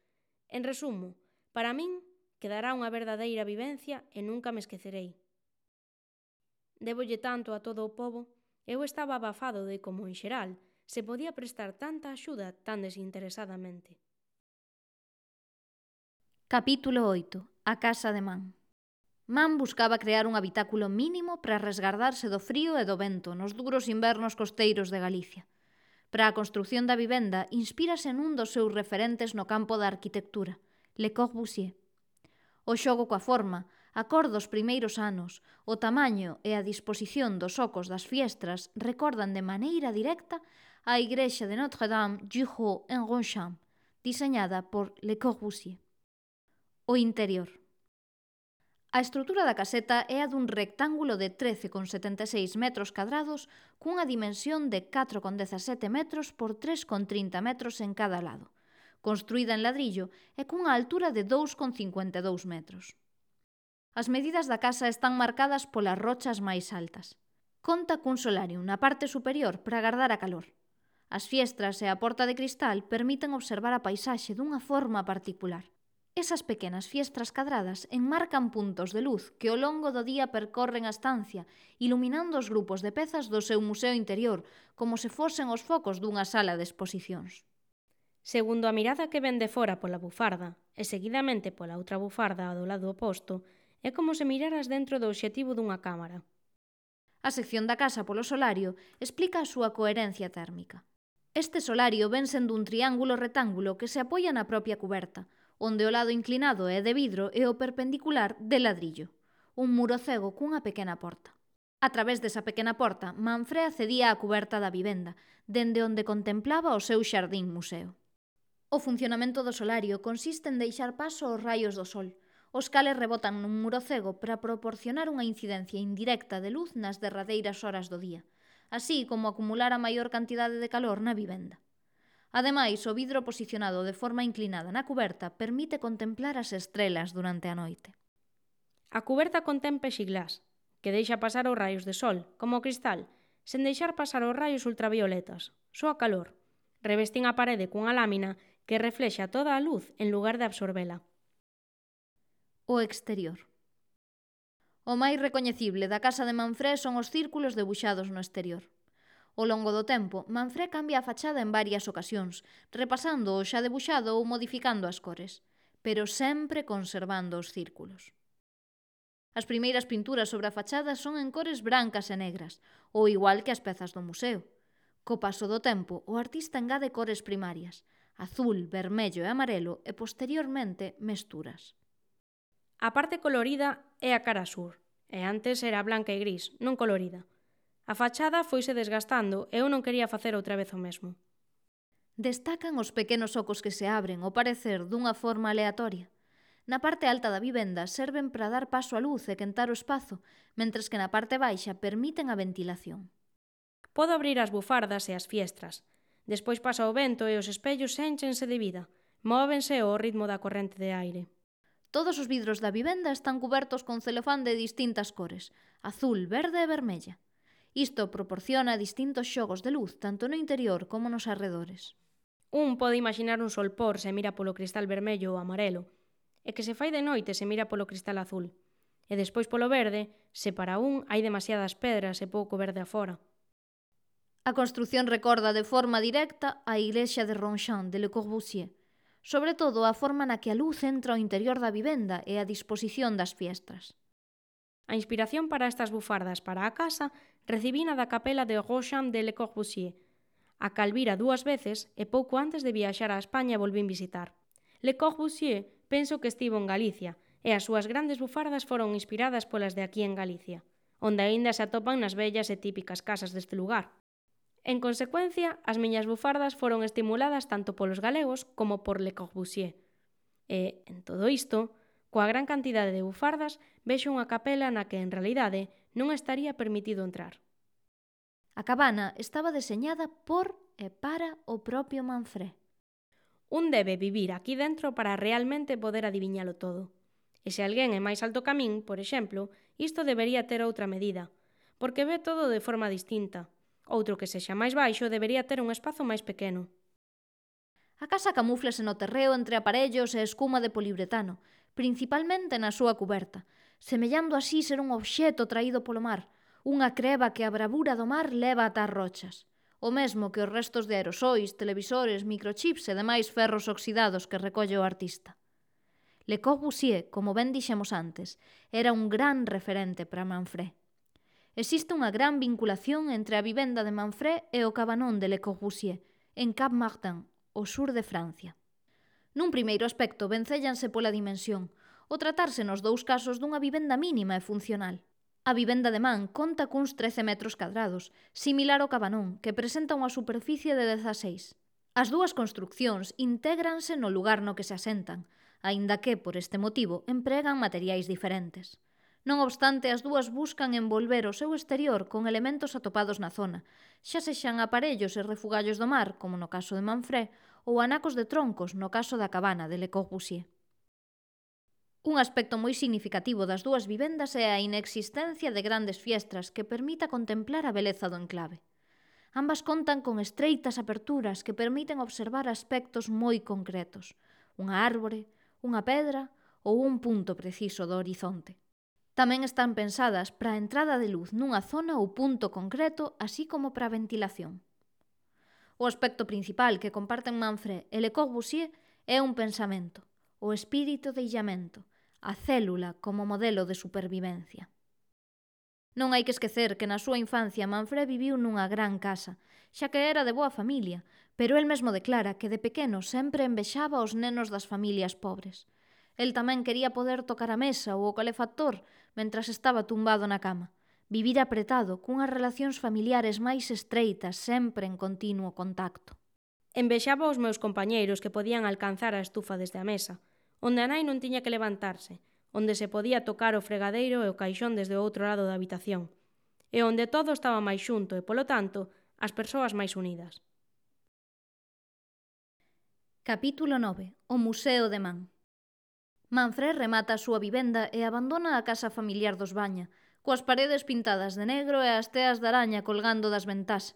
Speaker 2: En resumo, para min, quedará unha verdadeira vivencia e nunca me esquecerei. Débolle tanto a todo o pobo, eu estaba abafado de como, en xeral, se podía prestar tanta axuda tan desinteresadamente.
Speaker 1: Capítulo 8. A casa de Man. Man buscaba crear un habitáculo mínimo para resgardarse do frío e do vento nos duros invernos costeiros de Galicia. Para a construción da vivenda, inspírase nun dos seus referentes no campo da arquitectura, Le Corbusier. O xogo coa forma, a cor dos primeiros anos, o tamaño e a disposición dos ocos das fiestras recordan de maneira directa a igrexa de Notre-Dame du Haut en Ronchamp, diseñada por Le Corbusier. O interior. A estrutura da caseta é a dun rectángulo de 13,76 metros cadrados cunha dimensión de 4,17 metros por 3,30 metros en cada lado, construída en ladrillo e cunha altura de 2,52 metros. As medidas da casa están marcadas polas rochas máis altas. Conta cun solarium na parte superior para agardar a calor. As fiestras e a porta de cristal permiten observar a paisaxe dunha forma particular. Esas pequenas fiestras cadradas enmarcan puntos de luz que ao longo do día percorren a estancia, iluminando os grupos de pezas do seu museo interior, como se fosen os focos dunha sala de exposicións.
Speaker 2: Segundo a mirada que ven de fora pola bufarda e seguidamente pola outra bufarda do lado oposto, é como se miraras dentro do obxectivo dunha cámara.
Speaker 1: A sección da casa polo solario explica a súa coherencia térmica. Este solario ven sendo un triángulo rectángulo que se apoia na propia cuberta, onde o lado inclinado é de vidro e o perpendicular de ladrillo, un muro cego cunha pequena porta. A través desa pequena porta, Manfré accedía á cuberta da vivenda, dende onde contemplaba o seu xardín museo. O funcionamento do solario consiste en deixar paso aos raios do sol, os cales rebotan nun muro cego para proporcionar unha incidencia indirecta de luz nas derradeiras horas do día, así como acumular a maior cantidade de calor na vivenda. Ademais, o vidro posicionado de forma inclinada na cuberta permite contemplar as estrelas durante a noite.
Speaker 2: A cuberta contén plexiglas, que deixa pasar os raios de sol, como o cristal, sen deixar pasar os raios ultravioletas, só a calor. Revestín a parede cunha lámina que reflexa toda a luz en lugar de absorbela.
Speaker 1: O exterior. O máis recoñecible da casa de Manfré son os círculos debuxados no exterior. Ao longo do tempo, Manfré cambia a fachada en varias ocasións, repasando o xa debuxado ou modificando as cores, pero sempre conservando os círculos. As primeiras pinturas sobre a fachada son en cores brancas e negras, ou igual que as pezas do museo. Co paso do tempo, o artista engade cores primarias, azul, vermello e amarelo, e posteriormente mesturas.
Speaker 2: A parte colorida é a cara sur, e antes era blanca e gris, non colorida. A fachada foise desgastando e eu non quería facer outra vez o mesmo.
Speaker 1: Destacan os pequenos ocos que se abren, ao parecer, dunha forma aleatoria. Na parte alta da vivenda serven para dar paso á luz e quentar o espazo, mentres que na parte baixa permiten a ventilación.
Speaker 2: Podo abrir as bufardas e as fiestras. Despois pasa o vento e os espellos énchense de vida. Móvense ao ritmo da corrente de aire.
Speaker 1: Todos os vidros da vivenda están cubertos con celofán de distintas cores, azul, verde e vermella. Isto proporciona distintos xogos de luz tanto no interior como nos arredores.
Speaker 2: Un pode imaginar un solpor se mira polo cristal vermello ou amarelo, e que se fai de noite se mira polo cristal azul. E despois polo verde, se para un hai demasiadas pedras e pouco verde afora.
Speaker 1: A construción recorda de forma directa a igrexa de Ronchamp de Le Corbusier, sobre todo a forma na que a luz entra ao interior da vivenda e a disposición das fiestras.
Speaker 2: A inspiración para estas bufardas para a casa recibina da capela de Ronchamp de Le Corbusier, a cal vira 2 veces e pouco antes de viaxar a España volvín visitar. Le Corbusier penso que estivo en Galicia e as súas grandes bufardas foron inspiradas polas de aquí en Galicia, onde aínda se atopan nas bellas e típicas casas deste lugar. En consecuencia, as miñas bufardas foron estimuladas tanto polos galegos como por Le Corbusier. E, en todo isto, coa gran cantidade de bufardas, vexo unha capela na que, en realidade, non estaría permitido entrar.
Speaker 1: A cabana estaba deseñada por e para o propio Manfré.
Speaker 2: Un debe vivir aquí dentro para realmente poder adiviñalo todo. E se alguén é máis alto que min, por exemplo, isto debería ter outra medida, porque ve todo de forma distinta. Outro que sexa máis baixo debería ter un espazo máis pequeno.
Speaker 1: A casa camúflase no terreo entre aparellos e escuma de poliuretano, principalmente na súa cuberta, semellando así ser un obxeto traído polo mar, unha creba que a bravura do mar leva ata as rochas, o mesmo que os restos de aerosois, televisores, microchips e demais ferros oxidados que recolle o artista. Le Corbusier, como ben dixemos antes, era un gran referente para Manfré. Existe unha gran vinculación entre a vivenda de Manfré e o cabanón de Le Corbusier, en Cap Martin, ao sur de Francia. Nun primeiro aspecto vencéllanse pola dimensión, o tratarse nos dous casos dunha vivenda mínima e funcional. A vivenda de Man conta cuns 13 metros cadrados, similar ao cabanón, que presenta unha superficie de 16. As dúas construccións intégranse no lugar no que se asentan, aínda que, por este motivo, empregan materiais diferentes. Non obstante, as dúas buscan envolver o seu exterior con elementos atopados na zona, xa sexan aparellos e refugallos do mar, como no caso de Manfré, ou anacos de troncos, no caso da cabana de Le Corbusier. Un aspecto moi significativo das dúas vivendas é a inexistencia de grandes fiestras que permita contemplar a beleza do enclave. Ambas contan con estreitas aperturas que permiten observar aspectos moi concretos, unha árbore, unha pedra ou un punto preciso do horizonte. Tamén están pensadas para a entrada de luz nunha zona ou punto concreto, así como para a ventilación. O aspecto principal que comparten Manfré e Le Corbusier é un pensamento, o espírito de illamento, a célula como modelo de supervivencia. Non hai que esquecer que na súa infancia Manfré viviu nunha gran casa, xa que era de boa familia, pero el mesmo declara que de pequeno sempre envexaba os nenos das familias pobres. El tamén quería poder tocar a mesa ou o calefactor mentras estaba tumbado na cama, vivir apretado cunhas relacións familiares máis estreitas sempre en continuo contacto.
Speaker 2: Envexaba os meus compañeiros que podían alcanzar a estufa desde a mesa, onde a nai non tiña que levantarse, onde se podía tocar o fregadeiro e o caixón desde o outro lado da habitación, e onde todo estaba máis xunto e, polo tanto, as persoas máis unidas.
Speaker 1: Capítulo 9. O Museo de Man. Manfré remata a súa vivenda e abandona a casa familiar dos Baña, coas paredes pintadas de negro e as teas de araña colgando das ventás,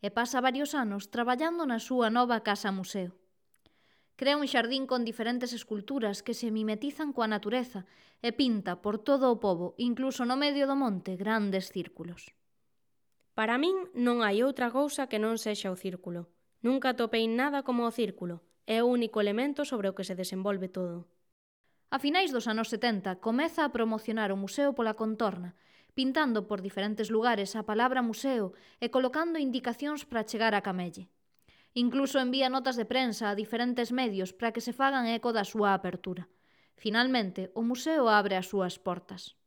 Speaker 1: e pasa varios anos traballando na súa nova casa-museo. Crea un xardín con diferentes esculturas que se mimetizan coa natureza e pinta por todo o pobo, incluso no medio do monte, grandes círculos.
Speaker 2: Para min non hai outra cousa que non sexa o círculo. Nunca atopei nada como o círculo. É o único elemento sobre o que se desenvolve todo.
Speaker 1: A finais dos anos 70 comeza a promocionar o museo pola contorna, pintando por diferentes lugares a palabra museo e colocando indicacións para chegar a Camelle. Incluso envía notas de prensa a diferentes medios para que se fagan eco da súa apertura. Finalmente, o museo abre as súas portas.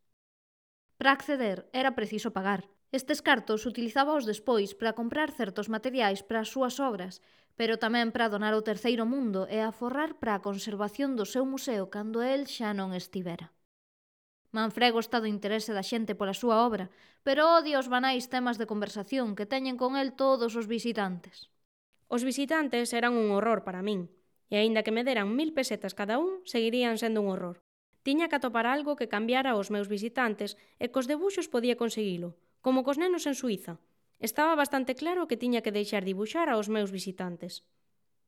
Speaker 1: Para acceder era preciso pagar. Estes cartos utilizábaos despois para comprar certos materiais para as súas obras, pero tamén para donar ao terceiro mundo e aforrar para a conservación do seu museo cando el xa non estivera. Manfrego está do interese da xente pola súa obra, pero odia os banais temas de conversación que teñen con el todos os visitantes.
Speaker 2: Os visitantes eran un horror para min, e aínda que me deran 1000 pesetas cada un, seguirían sendo un horror. Tiña que atopar algo que cambiara os meus visitantes e cos debuxos podía conseguilo, como cos nenos en Suíza. Estaba bastante claro que tiña que deixar dibuxar aos meus visitantes.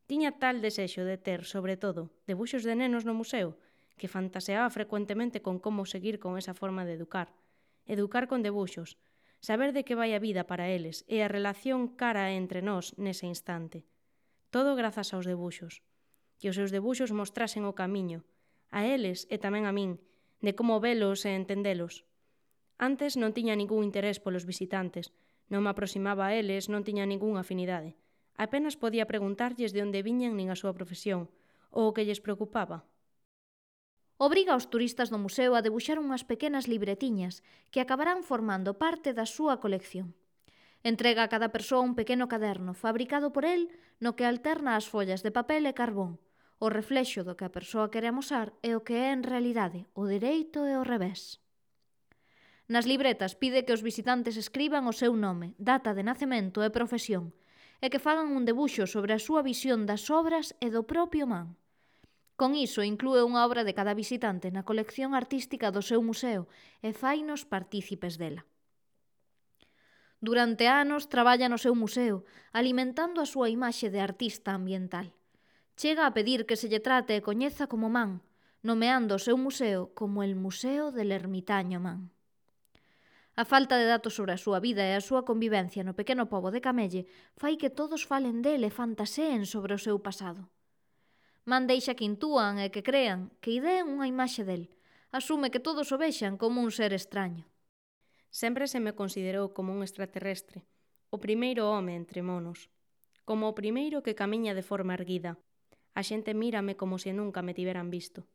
Speaker 2: Tiña tal desexo de ter, sobre todo, debuxos de nenos no museo, que fantaseaba frecuentemente con como seguir con esa forma de educar. Educar con debuxos, saber de que vai a vida para eles e a relación cara entre nós nese instante. Todo grazas aos debuxos. Que os seus debuxos mostrasen o camiño, a eles e tamén a min, de como velos e entendelos. Antes non tiña ningún interés polos visitantes, non me aproximaba a eles, non tiña ningunha afinidade. Apenas podía preguntarlles de onde viñan nin a súa profesión, ou o que lles preocupaba.
Speaker 1: Obriga aos turistas do museo a debuxar unhas pequenas libretiñas que acabarán formando parte da súa colección. Entrega a cada persoa un pequeno caderno fabricado por el no que alterna as follas de papel e carbón, o reflexo do que a persoa quere amosar e o que é en realidade o dereito e o revés. Nas libretas pide que os visitantes escriban o seu nome, data de nacemento e profesión, e que fagan un debuxo sobre a súa visión das obras e do propio man. Con iso inclúe unha obra de cada visitante na colección artística do seu museo e fainos partícipes dela. Durante anos traballa no seu museo, alimentando a súa imaxe de artista ambiental. Chega a pedir que se lle trate e coñeza como man, nomeando o seu museo como el Museo del Ermitaño Man. A falta de datos sobre a súa vida e a súa convivencia no pequeno pobo de Camelle fai que todos falen del e fantaseen sobre o seu pasado. Man deixa que intúan e que crean, que ideen unha imaxe del. Asume que todos o vexan como un ser extraño.
Speaker 2: Sempre se me considerou como un extraterrestre, o primeiro home entre monos, como o primeiro que camiña de forma erguida. A xente mírame como se nunca me tiveran visto.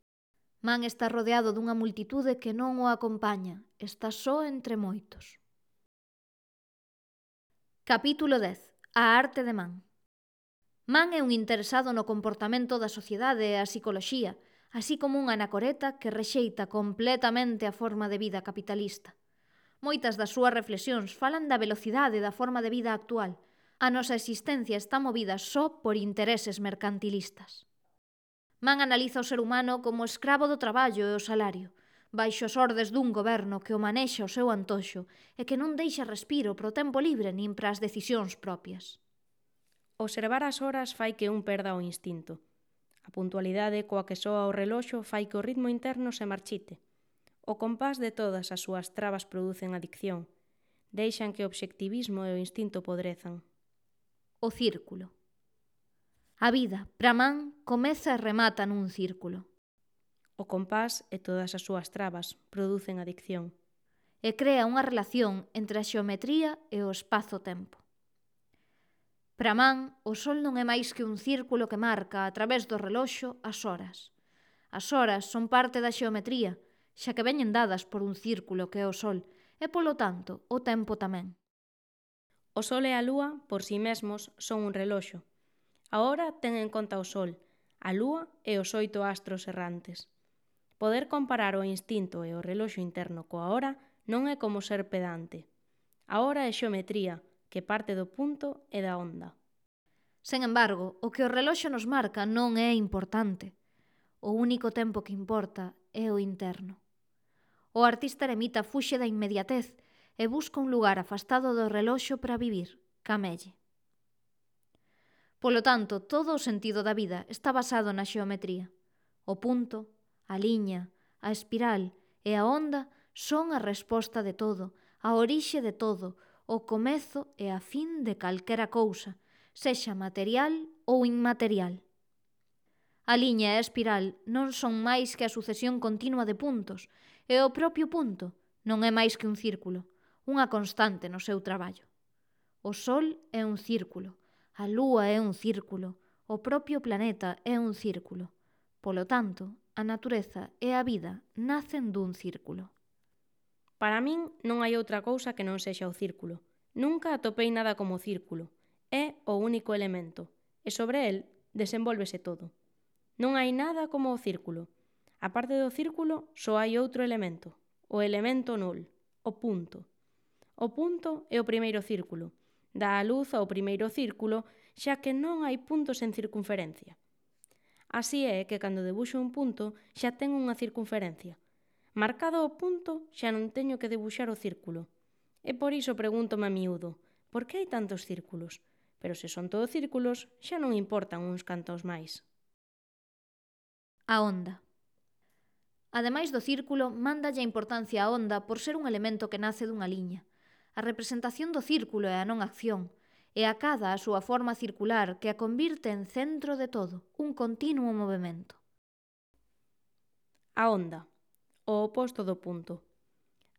Speaker 1: Man está rodeado dunha multitude que non o acompaña, está só entre moitos. Capítulo 10. A arte de Man. Man é un interesado no comportamento da sociedade e a psicoloxía, así como un anacoreta que rexeita completamente a forma de vida capitalista. Moitas das súas reflexións falan da velocidade da forma de vida actual. A nosa existencia está movida só por intereses mercantilistas. Man analiza o ser humano como escravo do traballo e o salario, baixo as ordes dun goberno que o manexa ao seu antoxo e que non deixa respiro pro tempo libre nin para as decisións propias.
Speaker 2: Observar as horas fai que un perda o instinto. A puntualidade coa que soa o reloxo fai que o ritmo interno se marchite. O compás de todas as súas trabas producen adicción. Deixan que o obxectivismo e o instinto podrezan.
Speaker 1: O círculo. A vida, para Man, comeza e remata nun círculo.
Speaker 2: O compás e todas as súas trabas producen adicción.
Speaker 1: E crea unha relación entre a xeometría e o espazo-tempo. Para Man, o sol non é máis que un círculo que marca, a través do reloxo, as horas. As horas son parte da xeometría, xa que veñen dadas por un círculo que é o sol, e, polo tanto, o tempo tamén.
Speaker 2: O sol e a lúa, por si mesmos, son un reloxo. A hora ten en conta o sol, a lúa e os 8 astros errantes. Poder comparar o instinto e o reloxo interno coa hora non é como ser pedante. A hora é xeometría, que parte do punto e da onda.
Speaker 1: Sen embargo, o que o reloxo nos marca non é importante. O único tempo que importa é o interno. O artista eremita fuxe da inmediatez e busca un lugar afastado do reloxo para vivir, camelle. Polo tanto, todo o sentido da vida está basado na xeometría. O punto, a liña, a espiral e a onda son a resposta de todo, a orixe de todo, o comezo e a fin de calquera cousa, sexa material ou inmaterial. A liña e a espiral non son máis que a sucesión continua de puntos, e o propio punto non é máis que un círculo, unha constante no seu traballo. O Sol é un círculo, a Lúa é un círculo, o propio planeta é un círculo. Polo tanto, a natureza e a vida nacen dun círculo.
Speaker 2: Para min non hai outra cousa que non sexa o círculo. Nunca atopei nada como o círculo. É o único elemento, e sobre el desenvólvese todo. Non hai nada como o círculo. A parte do círculo, só hai outro elemento, o elemento nul, o punto. O punto é o primeiro círculo. Dá a luz ao primeiro círculo, xa que non hai puntos en circunferencia. Así é que cando debuxo un punto xa ten unha circunferencia. Marcado o punto xa non teño que debuxar o círculo. E por iso pregúntome a miúdo, por que hai tantos círculos? Pero se son todos círculos, xa non importan uns cantos máis.
Speaker 1: A onda. Ademais do círculo, mándalle a importancia á onda por ser un elemento que nace dunha liña. A representación do círculo é a non acción, e a cada a súa forma circular que a convirte en centro de todo, un continuo movemento.
Speaker 2: A onda, o oposto do punto.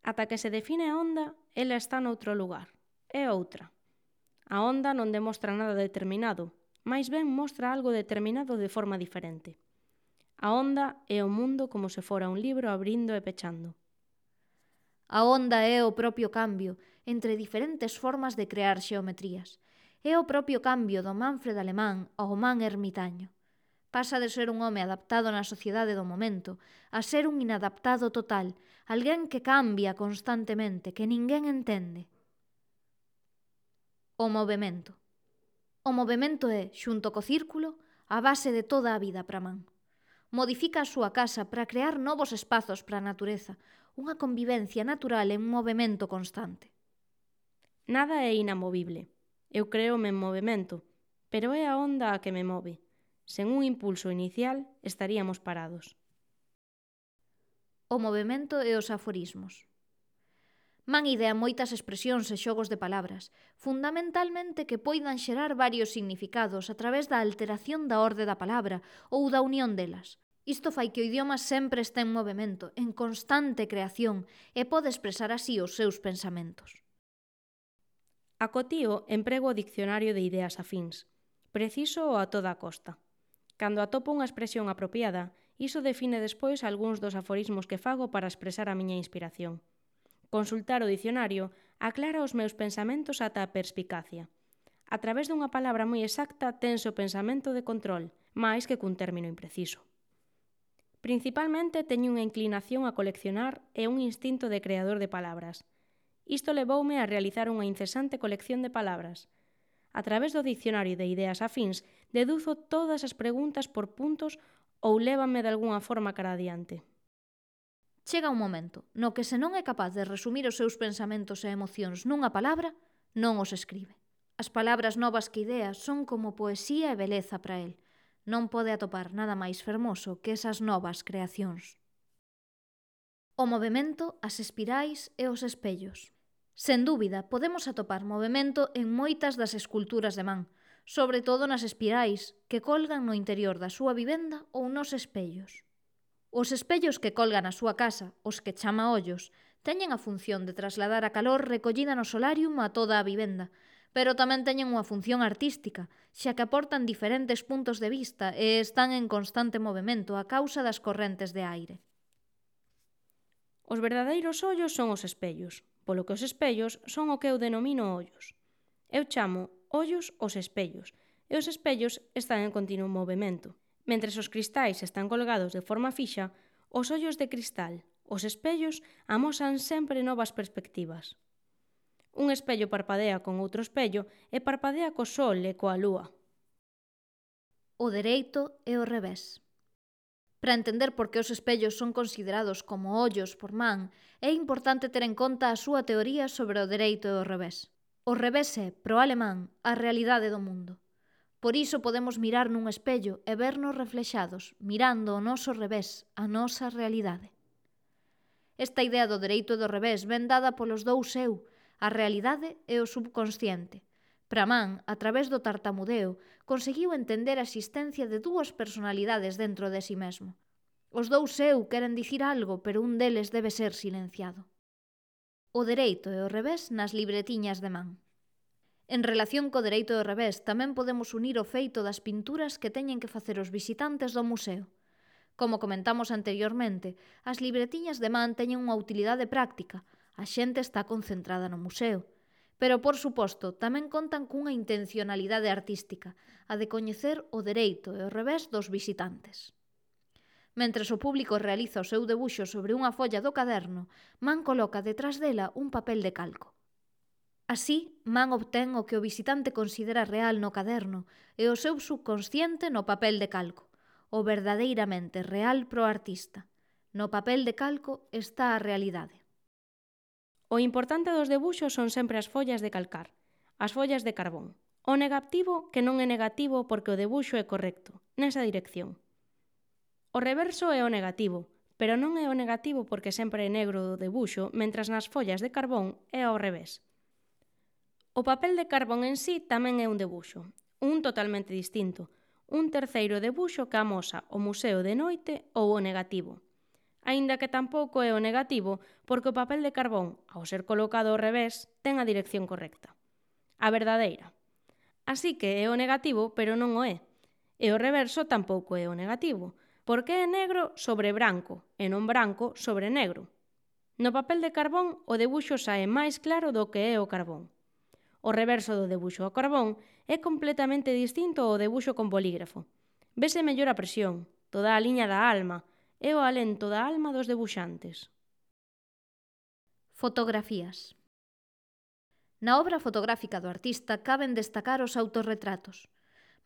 Speaker 2: Ata que se define a onda, ela está noutro lugar, é outra. A onda non demostra nada determinado, máis ben mostra algo determinado de forma diferente. A onda é o mundo como se fora un libro abrindo e pechando.
Speaker 1: A onda é o propio cambio entre diferentes formas de crear xeometrías. É o propio cambio do Manfred alemán ao man ermitaño. Pasa de ser un home adaptado na sociedade do momento a ser un inadaptado total, alguén que cambia constantemente, que ninguén entende. O movemento. O movemento é, xunto co círculo, a base de toda a vida para man. Modifica a súa casa para crear novos espazos para a natureza, unha convivencia natural en movimento constante.
Speaker 2: Nada é inamovible. Eu creome en movimento, pero é a onda a que me move. Sen un impulso inicial, estaríamos parados.
Speaker 1: O movemento e os aforismos. Man idea moitas expresións e xogos de palabras, fundamentalmente que poidan xerar varios significados a través da alteración da orde da palabra ou da unión delas. Isto fai que o idioma sempre este en movimento, en constante creación, e pode expresar así os seus pensamentos.
Speaker 2: Acotío emprego o diccionario de ideas afíns. Preciso a toda costa. Cando atopo unha expresión apropiada, iso define despois algúns dos aforismos que fago para expresar a miña inspiración. Consultar o dicionario aclara os meus pensamentos ata a perspicacia. A través dunha palabra moi exacta tense o pensamento de control, máis que cun término impreciso. Principalmente teño unha inclinación a coleccionar e un instinto de creador de palabras. Isto levoume a realizar unha incesante colección de palabras. A través do dicionario de ideas afíns deduzo todas as preguntas por puntos ou lévame de algunha forma cara adiante.
Speaker 1: Chega un momento no que se non é capaz de resumir os seus pensamentos e emocións nunha palabra, non os escribe. As palabras novas que ideas son como poesía e beleza para el. Non pode atopar nada máis fermoso que esas novas creacións. O movemento, as espirais e os espellos. Sen dúbida, podemos atopar movemento en moitas das esculturas de man, sobre todo nas espirais que colgan no interior da súa vivenda ou nos espellos. Os espellos que colgan na súa casa, os que chama ollos, teñen a función de trasladar a calor recollida no solarium a toda a vivenda, pero tamén teñen unha función artística, xa que aportan diferentes puntos de vista e están en constante movimento a causa das correntes de aire.
Speaker 2: Os verdadeiros ollos son os espellos, polo que os espellos son o que eu denomino ollos. Eu chamo ollos os espellos, e os espellos están en continuo movimento. Mentres os cristais están colgados de forma fixa, os ollos de cristal, os espellos, amosan sempre novas perspectivas. Un espello parpadea con outro espello e parpadea co sol e coa lúa.
Speaker 1: O dereito e o revés. Para entender por que os espellos son considerados como ollos por Man, é importante ter en conta a súa teoría sobre o dereito e o revés. O revés é, pro alemán, a realidade do mundo. Por iso podemos mirar nun espello e vernos reflexados, mirando o noso revés, a nosa realidade. Esta idea do dereito e do revés ven dada polos dous eu, a realidade e o subconsciente. Para Man, a través do tartamudeo, conseguiu entender a existencia de dúas personalidades dentro de si mesmo. Os dous eu queren dicir algo, pero un deles debe ser silenciado. O dereito e o revés nas libretiñas de Man. En relación co dereito e o revés, tamén podemos unir o feito das pinturas que teñen que facer os visitantes do museo. Como comentamos anteriormente, as libretiñas de Man teñen unha utilidade práctica. A xente está concentrada no museo. Pero, por suposto, tamén contan cunha intencionalidade artística, a de coñecer o dereito e o revés dos visitantes. Mentres o público realiza o seu debuxo sobre unha folla do caderno, Man coloca detrás dela un papel de calco. Así, Man obtén o que o visitante considera real no caderno e o seu subconsciente no papel de calco, o verdadeiramente real pro artista. No papel de calco está a realidade.
Speaker 2: O importante dos debuxos son sempre as follas de calcar, as follas de carbón. O negativo que non é negativo porque o debuxo é correcto, nesa dirección. O reverso é o negativo, pero non é o negativo porque sempre é negro o debuxo, mentras nas follas de carbón é ao revés. O papel de carbón en sí tamén é un debuxo, un totalmente distinto, un terceiro debuxo que amosa o museo de noite ou o negativo. Aínda que tampouco é o negativo, porque o papel de carbón, ao ser colocado ao revés, ten a dirección correcta. A verdadeira. Así que é o negativo, pero non o é. E o reverso tampouco é o negativo, porque é negro sobre branco, e non branco sobre negro. No papel de carbón, o debuxo sae máis claro do que é o carbón. O reverso do debuxo ao carbón é completamente distinto ao debuxo con bolígrafo. Vese mellor a presión, toda a liña da alma, é o alento da alma dos debuxantes.
Speaker 1: Fotografías. Na obra fotográfica do artista caben destacar os autorretratos.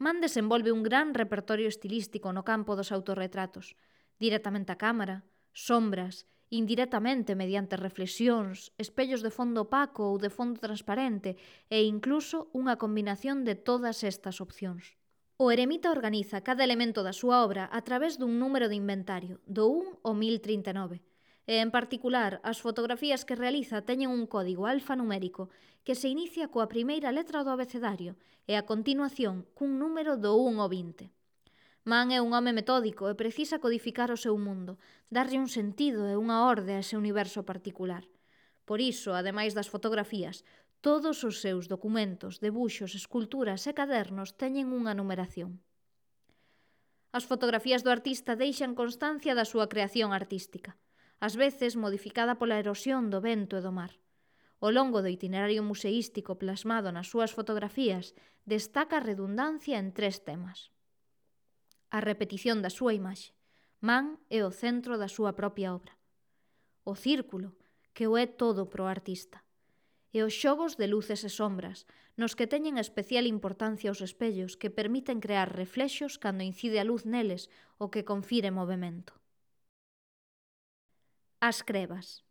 Speaker 1: Man desenvolve un gran repertorio estilístico no campo dos autorretratos, directamente a cámara, sombras, indirectamente mediante reflexións, espellos de fondo opaco ou de fondo transparente e incluso unha combinación de todas estas opcións. O eremita organiza cada elemento da súa obra a través dun número de inventario, do 1 ao 1039, e, en particular, as fotografías que realiza teñen un código alfanumérico que se inicia coa primeira letra do abecedario e, a continuación, cun número do 1 ao 20. Man é un home metódico e precisa codificar o seu mundo, darlle un sentido e unha orde a ese universo particular. Por iso, ademais das fotografías, todos os seus documentos, debuxos, esculturas e cadernos teñen unha numeración. As fotografías do artista deixan constancia da súa creación artística, ás veces modificada pola erosión do vento e do mar. Ao longo do itinerario museístico plasmado nas súas fotografías, destaca a redundancia en 3 temas. A repetición da súa imaxe. Man é o centro da súa propia obra. O círculo, que o é todo pro artista. E os xogos de luces e sombras, nos que teñen especial importancia os espellos que permiten crear reflexos cando incide a luz neles, o que confire movimento. As crebas.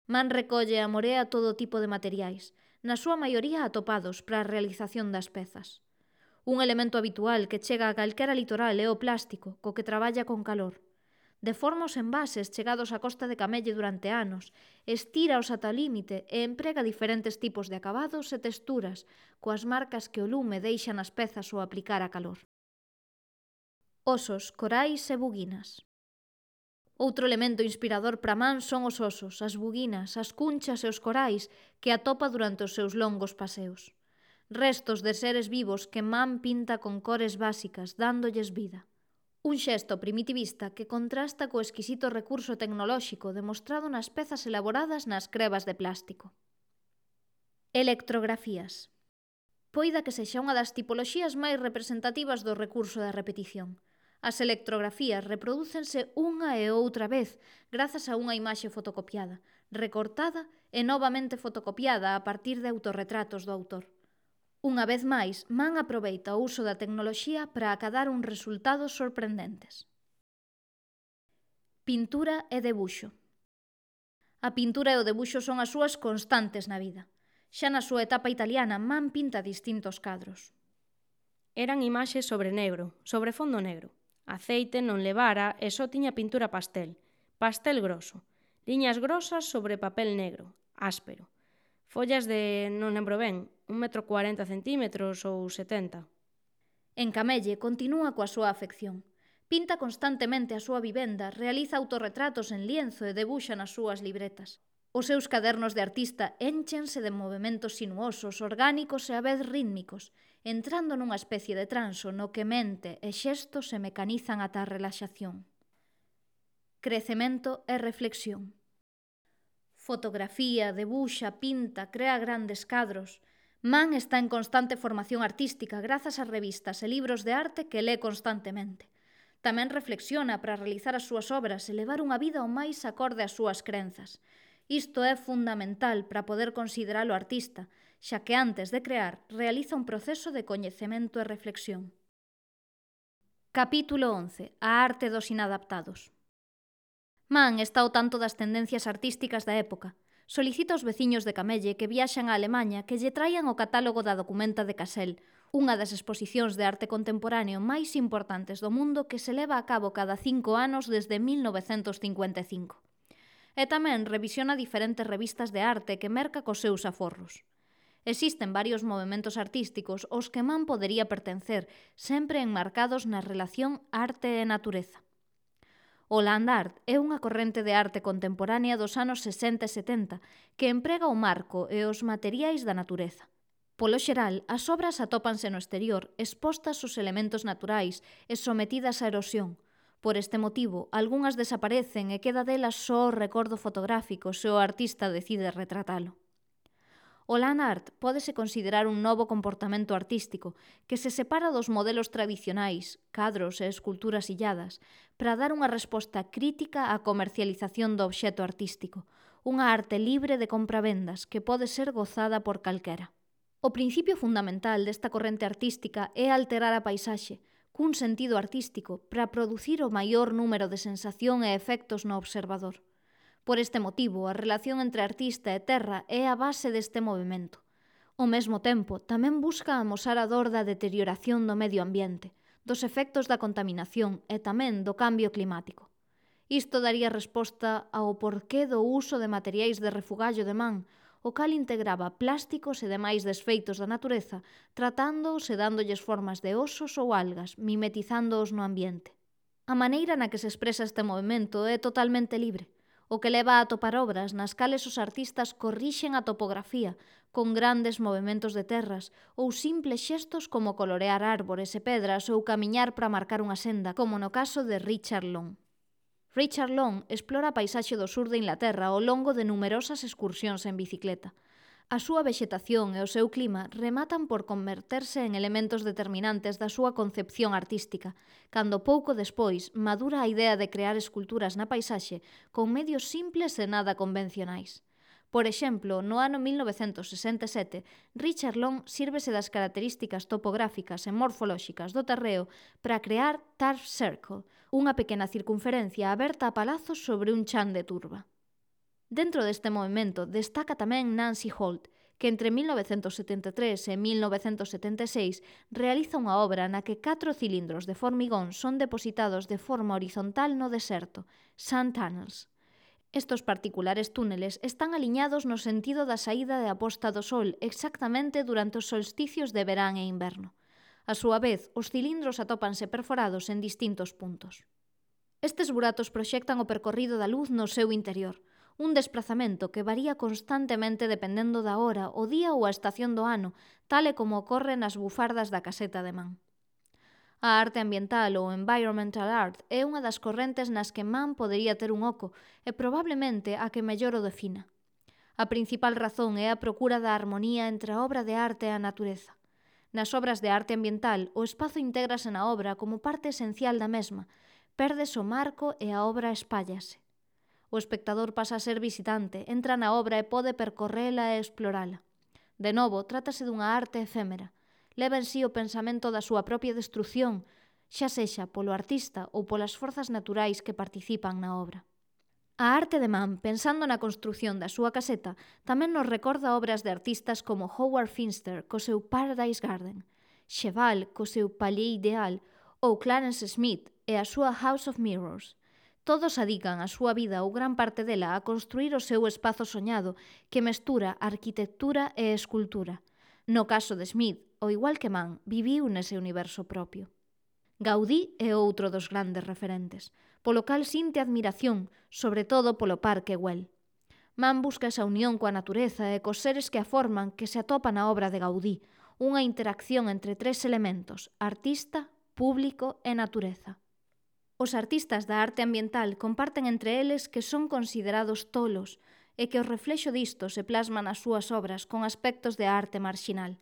Speaker 1: Man recolle e amorea todo tipo de materiais, na súa maioría atopados para a realización das pezas. Un elemento habitual que chega a calquera litoral é o plástico, co que traballa con calor. Deforma os envases chegados á costa de Camelle durante anos, estíraos ata o límite e emprega diferentes tipos de acabados e texturas, coas marcas que o lume deixa nas pezas ao aplicar a calor. Osos, corais e buguinas. Outro elemento inspirador para Man son os osos, as buguinas, as cunchas e os corais que atopa durante os seus longos paseos. Restos de seres vivos que Man pinta con cores básicas, dándolles vida. Un xesto primitivista que contrasta co exquisito recurso tecnolóxico demostrado nas pezas elaboradas nas crebas de plástico. Electrografías. Poida que sexa unha das tipoloxías máis representativas do recurso da repetición. As electrografías reprodúcense unha e outra vez grazas a unha imaxe fotocopiada, recortada e novamente fotocopiada a partir de autorretratos do autor. Unha vez máis, Man aproveita o uso da tecnoloxía para acadar uns resultados sorprendentes. Pintura e debuxo. A pintura e o debuxo son as súas constantes na vida. Xa na súa etapa italiana, Mann pinta distintos cadros.
Speaker 2: Eran imaxes sobre negro, sobre fondo negro. Aceite non levara e só tiña pintura pastel groso, liñas grosas sobre papel negro, áspero. Follas de, non lembro ben, 1,40 m ou 70.
Speaker 1: En Camelle continúa coa súa afección. Pinta constantemente a súa vivenda, realiza autorretratos en lienzo e debuxa nas súas libretas. Os seus cadernos de artista énchense de movementos sinuosos, orgánicos e a vez rítmicos, entrando nunha especie de transo no que mente e xestos se mecanizan ata a relaxación. Crecemento e reflexión. Fotografía, debuxa, pinta, crea grandes cadros. Mann está en constante formación artística grazas ás revistas e libros de arte que lé constantemente. Tamén reflexiona para realizar as súas obras e levar unha vida o máis acorde ás súas crenzas. Isto é fundamental para poder consideralo artista, xa que antes de crear realiza un proceso de coñecemento e reflexión. Capítulo 11. A arte dos inadaptados. Mann está ao tanto das tendencias artísticas da época. Solicita aos veciños de Camelle que viaxan a Alemanha que lle traian o catálogo da Documenta de Kassel, unha das exposicións de arte contemporáneo máis importantes do mundo que se leva a cabo cada 5 anos desde 1955. E tamén revisiona diferentes revistas de arte que merca cos seus aforros. Existen varios movementos artísticos aos que Mann podería pertencer, sempre enmarcados na relación arte e natureza. O land art é unha corrente de arte contemporánea dos anos 60 e 70 que emprega o marco e os materiais da natureza. Polo xeral, as obras atópanse no exterior, expostas aos elementos naturais e sometidas á erosión. Por este motivo, algunhas desaparecen e queda delas só o recordo fotográfico se o artista decide retratalo. O land art pódese considerar un novo comportamento artístico que se separa dos modelos tradicionais, cadros e esculturas illadas, para dar unha resposta crítica á comercialización do obxecto artístico, unha arte libre de compravendas que pode ser gozada por calquera. O principio fundamental desta corrente artística é alterar a paisaxe, cun sentido artístico, para producir o maior número de sensación e efectos no observador. Por este motivo, a relación entre artista e terra é a base deste movimento. Ao mesmo tempo, tamén busca amosar a dor da deterioración do medio ambiente, dos efectos da contaminación e tamén do cambio climático. Isto daría resposta ao porqué do uso de materiais de refugallo de Mann, o cal integraba plásticos e demais desfeitos da natureza, tratándoos e dándolles formas de osos ou algas, mimetizándoos no ambiente. A maneira na que se expresa este movimento é totalmente libre, o que leva a atopar obras nas cales os artistas corrixen a topografía con grandes movementos de terras ou simples xestos como colorear árbores e pedras ou camiñar para marcar unha senda, como no caso de Richard Long. Richard Long explora a paisaxe do sur de Inglaterra ao longo de numerosas excursións en bicicleta. A súa vexetación e o seu clima rematan por converterse en elementos determinantes da súa concepción artística, cando pouco despois madura a idea de crear esculturas na paisaxe con medios simples e nada convencionais. Por exemplo, no ano 1967, Richard Long sírvese das características topográficas e morfolóxicas do terreo para crear Turf Circle, unha pequena circunferencia aberta a palazos sobre un chan de turba. Dentro deste movimento destaca tamén Nancy Holt, que entre 1973 e 1976 realiza unha obra na que 4 cilindros de formigón son depositados de forma horizontal no deserto, Sand Tunnels. Estos particulares túneles están aliñados no sentido da saída e a posta do sol exactamente durante os solsticios de verán e inverno. A súa vez, os cilindros atópanse perforados en distintos puntos. Estes buratos proxectan o percorrido da luz no seu interior, un desprazamento que varía constantemente dependendo da hora, o día ou a estación do ano, tal e como ocorre nas bufardas da caseta de Mann. A arte ambiental ou environmental art é unha das correntes nas que Mann podería ter un oco e probablemente a que mellor o defina. A principal razón é a procura da armonía entre a obra de arte e a natureza. Nas obras de arte ambiental, o espazo intégrase na obra como parte esencial da mesma, pérdese o marco e a obra espállase. O espectador pasa a ser visitante, entra na obra e pode percorrela e explorala. De novo, trátase dunha arte efémera. Leva en sí o pensamento da súa propia destrucción, xa sexa polo artista ou polas forzas naturais que participan na obra. A arte de Mann, pensando na construción da súa caseta, tamén nos recorda obras de artistas como Howard Finster co seu Paradise Garden, Cheval co seu Palais Ideal ou Clarence Smith e a súa House of Mirrors. Todos adican a súa vida ou gran parte dela a construir o seu espazo soñado que mestura arquitectura e escultura. No caso de Smith, ao igual que Mann, viviu nese universo propio. Gaudí é outro dos grandes referentes, polo cal sinte admiración, sobre todo polo Parque Güell. Mann busca esa unión coa natureza e cos seres que a forman que se atopa na obra de Gaudí, unha interacción entre tres elementos, artista, público e natureza. Os artistas da arte ambiental comparten entre eles que son considerados tolos e que o reflexo disto se plasma nas súas obras con aspectos de arte marxinal.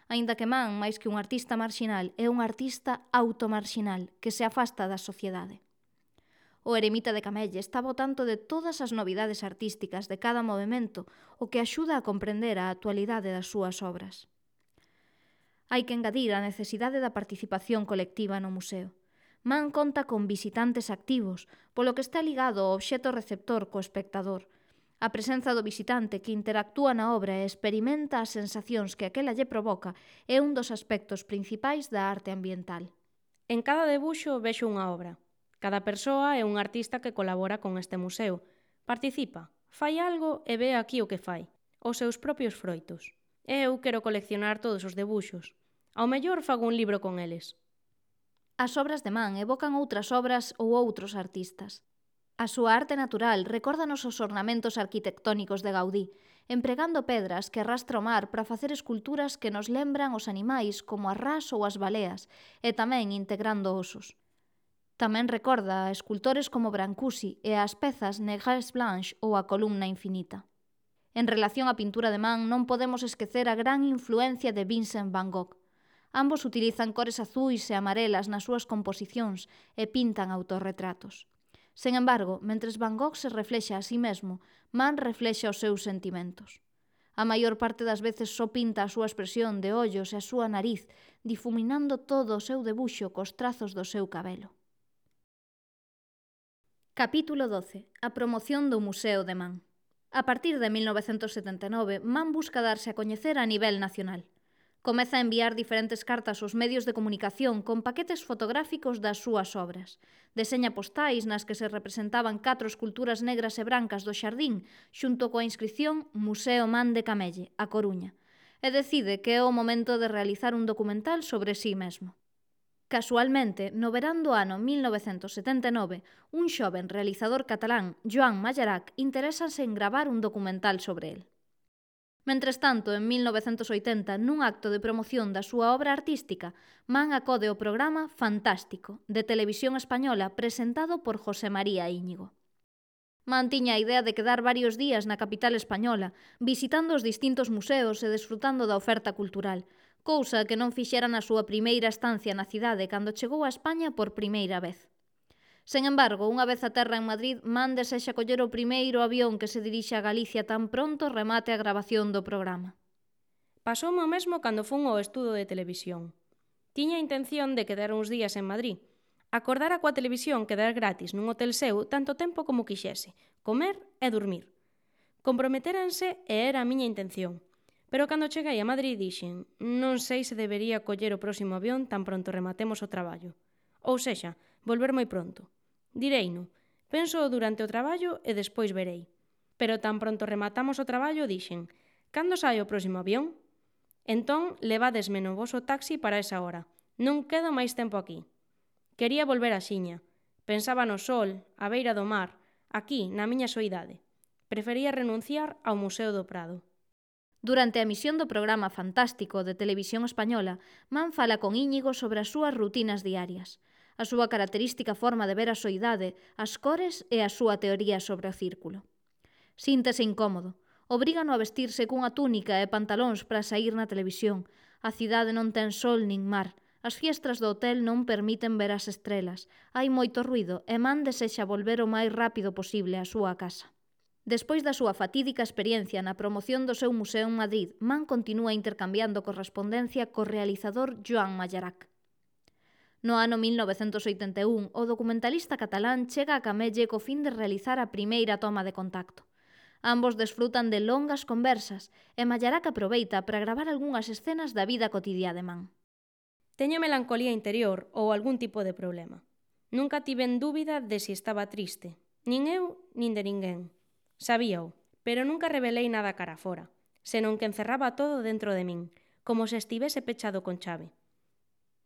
Speaker 1: Aínda que Mann, máis que un artista marxinal, é un artista automarxinal que se afasta da sociedade. O eremita de Camelle está ao tanto de todas as novidades artísticas de cada movimento, o que axuda a comprender a actualidade das súas obras. Hai que engadir a necesidade da participación colectiva no museo. Mann conta con visitantes activos, polo que está ligado ao obxecto receptor co espectador. A presenza do visitante que interactúa na obra e experimenta as sensacións que aquela lle provoca é un dos aspectos principais da arte ambiental.
Speaker 2: En cada debuxo vexo unha obra. Cada persoa é un artista que colabora con este museo. Participa, fai algo e ve aquí o que fai, os seus propios froitos. Eu quero coleccionar todos os debuxos. Ao mellor fago un libro con eles.
Speaker 1: As obras de Mann evocan outras obras ou outros artistas. A súa arte natural recórdanos os ornamentos arquitectónicos de Gaudí, empregando pedras que arrastra o mar para facer esculturas que nos lembran os animais como as rás ou as baleas, e tamén integrando osos. Tamén recorda a escultores como Brancusi e as pezas Négresse Blanche ou a Columna Infinita. En relación á pintura de Mann non podemos esquecer a gran influencia de Vincent van Gogh. Ambos utilizan cores azuis e amarelas nas súas composicións e pintan autorretratos. Sen embargo, mentres Van Gogh se reflexa a sí mesmo, Mann reflexa os seus sentimentos. A maior parte das veces só pinta a súa expresión de ollos e a súa nariz, difuminando todo o seu debuxo cos trazos do seu cabelo. Capítulo 12. A promoción do Museo de Mann. A partir de 1979, Mann busca darse a coñecer a nivel nacional. Comeza a enviar diferentes cartas aos medios de comunicación con paquetes fotográficos das súas obras. Deseña postais nas que se representaban 4 esculturas negras e brancas do xardín xunto coa inscripción Museo Mann de Camelle, a Coruña, e decide que é o momento de realizar un documental sobre sí mesmo. Casualmente, no verán do ano 1979, un xoven realizador catalán, Joan Mallarac, interésase en gravar un documental sobre el. Mentres tanto, en 1980, nun acto de promoción da súa obra artística, Mann acode ao programa Fantástico, de Televisión Española, presentado por José María Íñigo. Mann tiña a idea de quedar varios días na capital española, visitando os distintos museos e desfrutando da oferta cultural, cousa que non fixera na súa primeira estancia na cidade cando chegou a España por primeira vez. Sen embargo, unha vez a terra en Madrid, Mann desexa coller o primeiro avión que se dirixe a Galicia tan pronto remate a gravación do programa.
Speaker 2: Pasoume o mesmo cando fun ao estudo de televisión. Tiña a intención de quedar uns días en Madrid. Acordara coa televisión quedar gratis nun hotel seu tanto tempo como quixese, comer e dormir. Comprometéranse e era a miña intención. Pero cando cheguei a Madrid dixen, non sei se debería coller o próximo avión tan pronto rematemos o traballo. Ou sexa, volver moi pronto. Direino, penso durante o traballo e despois verei. Pero tan pronto rematamos o traballo dixen, cando sai o próximo avión? Entón, levádesme no voso taxi para esa hora. Non quedo máis tempo aquí. Quería volver a Xiña. Pensaba no sol, a beira do mar, aquí, na miña soidade. Prefería renunciar ao Museo do Prado.
Speaker 1: Durante a emisión do programa Fantástico de Televisión Española, Mann fala con Íñigo sobre as súas rutinas diarias, a súa característica forma de ver a soidade, as cores e a súa teoría sobre o círculo. Síntese incómodo, obrígano a vestirse cunha túnica e pantalóns para saír na televisión, a cidade non ten sol nin mar, as fiestras do hotel non permiten ver as estrelas, hai moito ruído e Mann desexa volver o máis rápido posible á súa casa. Despois da súa fatídica experiencia na promoción do seu museo en Madrid, Mann continúa intercambiando correspondencia co realizador Joan Mallarac. No ano 1981, o documentalista catalán chega a Camelle co fin de realizar a primeira toma de contacto. Ambos desfrutan de longas conversas e Mallarac aproveita para gravar algunhas escenas da vida cotidiá de Man.
Speaker 2: Teño melancolía interior ou algún tipo de problema. Nunca tiven dúbida de si estaba triste. Nin eu, nin de ninguén. Sabíao, pero nunca revelei nada cara fora, senón que encerraba todo dentro de min, como se estivese pechado con chave.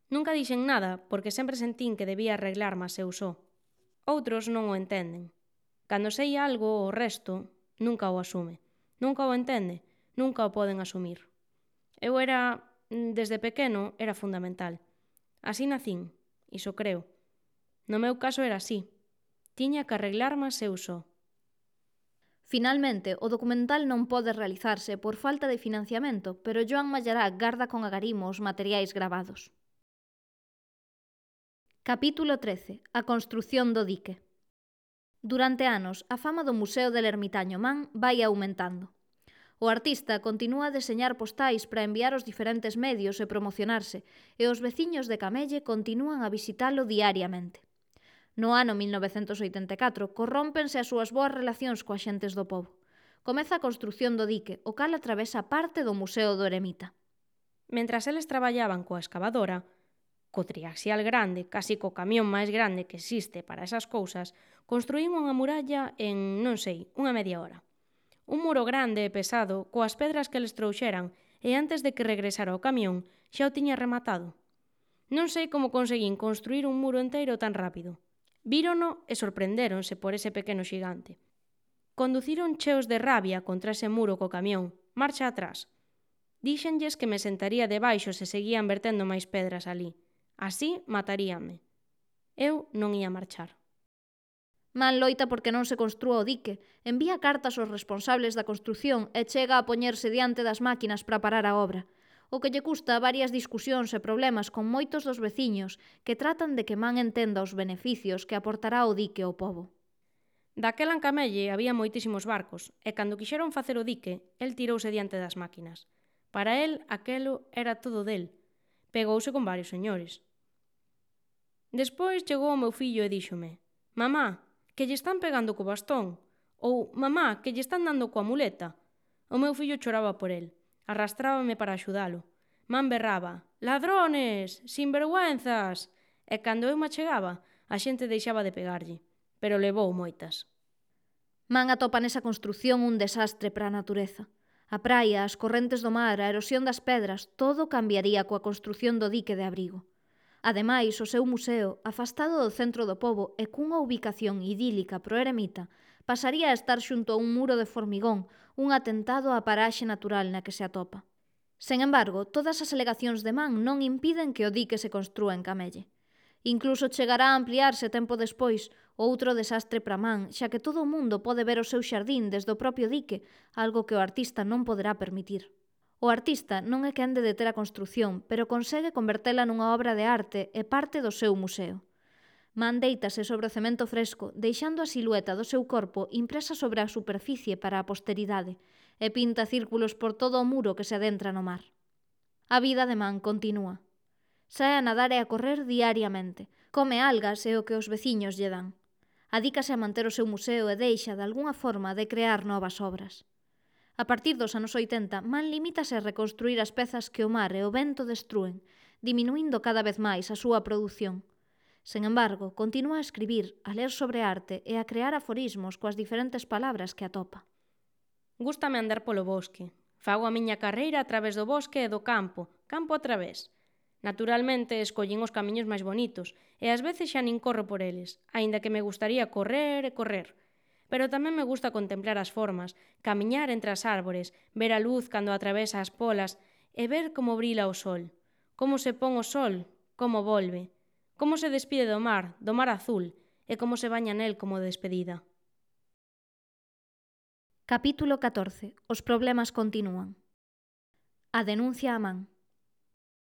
Speaker 2: Nunca dixen nada porque sempre sentín que debía arreglarme eu só. Outros non o entenden. Cando sei algo, o resto nunca o asume. Nunca o entende, nunca o poden asumir. Eu desde pequeno, era fundamental. Así nacín, iso creo. No meu caso era así. Tiña que arreglarme eu só.
Speaker 1: Finalmente, o documental non pode realizarse por falta de financiamento, pero Joan Mallarac garda con agarimo os materiais gravados. Capítulo 13. A construción do dique. Durante anos, a fama do Museo del Ermitaño Man vai aumentando. O artista continúa a deseñar postais para enviar aos diferentes medios e promocionarse, e os veciños de Camelle continúan a visitalo diariamente. No ano 1984, corrómpense as súas boas relacións coas xentes do pobo. Comeza a construción do dique, o cal atravesa parte do Museo do Eremita.
Speaker 2: Mentras eles traballaban coa escavadora, co triaxial grande, casi co camión máis grande que existe para esas cousas, construín unha muralla en, non sei, unha media hora. Un muro grande e pesado, coas pedras que eles trouxeran, e antes de que regresara o camión, xa o tiña rematado. Non sei como conseguín construir un muro enteiro tan rápido. Vírono e sorprendéronse por ese pequeno xigante. Conduciron cheos de rabia contra ese muro co camión, marcha atrás. Díxenlles que me sentaría debaixo se seguían vertendo máis pedras ali. Así mataríame. Eu non ia marchar.
Speaker 1: Man loita porque non se construa o dique, envía cartas aos responsables da construción e chega a poñerse diante das máquinas para parar a obra, o que lle custa varias discusións e problemas con moitos dos veciños que tratan de que Man entenda os beneficios que aportará o dique ao pobo.
Speaker 2: Daquela en Camelle había moitísimos barcos, e cando quixeron facer o dique, el tirouse diante das máquinas. Para el, aquelo era todo del. Pegouse con varios señores. Despois chegou o meu fillo e díxome: «Mamá, que lle están pegando co bastón», ou «Mamá, que lle están dando coa muleta». O meu fillo choraba por el, arrastrábame para axudalo. Man berraba: «Ladrones! Sinvergüenzas!» E cando eu me achegaba, a xente deixaba de pegarlle, pero levou moitas.
Speaker 1: Man atopa nesa construción un desastre para a natureza. A praia, as correntes do mar, a erosión das pedras, todo cambiaría coa construción do dique de abrigo. Ademais, o seu museo, afastado do centro do pobo e cunha ubicación idílica pro eremita, pasaría a estar xunto a un muro de formigón, un atentado á paraxe natural na que se atopa. Sen embargo, todas as alegacións de Man non impiden que o dique se construa en Camelle. Incluso chegará a ampliarse tempo despois, outro desastre para Man, xa que todo o mundo pode ver o seu xardín desde o propio dique, algo que o artista non poderá permitir. O artista non é quen de deter a construción, pero consegue convertela nunha obra de arte e parte do seu museo. Man deítase sobre o cemento fresco, deixando a silueta do seu corpo impresa sobre a superficie para a posteridade, e pinta círculos por todo o muro que se adentra no mar. A vida de Man continúa. Sae a nadar e a correr diariamente, come algas e o que os veciños lle dan. Adícase a manter o seu museo e deixa, de algunha forma, de crear novas obras. A partir dos anos 80, Man limítase a reconstruir as pezas que o mar e o vento destrúen, diminuindo cada vez máis a súa produción. Sen embargo, continúa a escribir, a ler sobre arte e a crear aforismos coas diferentes palabras que atopa.
Speaker 2: Gústame andar polo bosque. Fago a miña carreira a través do bosque e do campo, campo a través. Naturalmente, escollín os camiños máis bonitos, e ás veces xa nin corro por eles, aínda que me gustaría correr e correr. Pero tamén me gusta contemplar as formas, camiñar entre as árbores, ver a luz cando atravesa as polas e ver como brila o sol, como se pon o sol, como volve, como se despide do mar azul, e como se baña nel como despedida.
Speaker 1: Capítulo 14. Os problemas continúan. A denuncia a Man.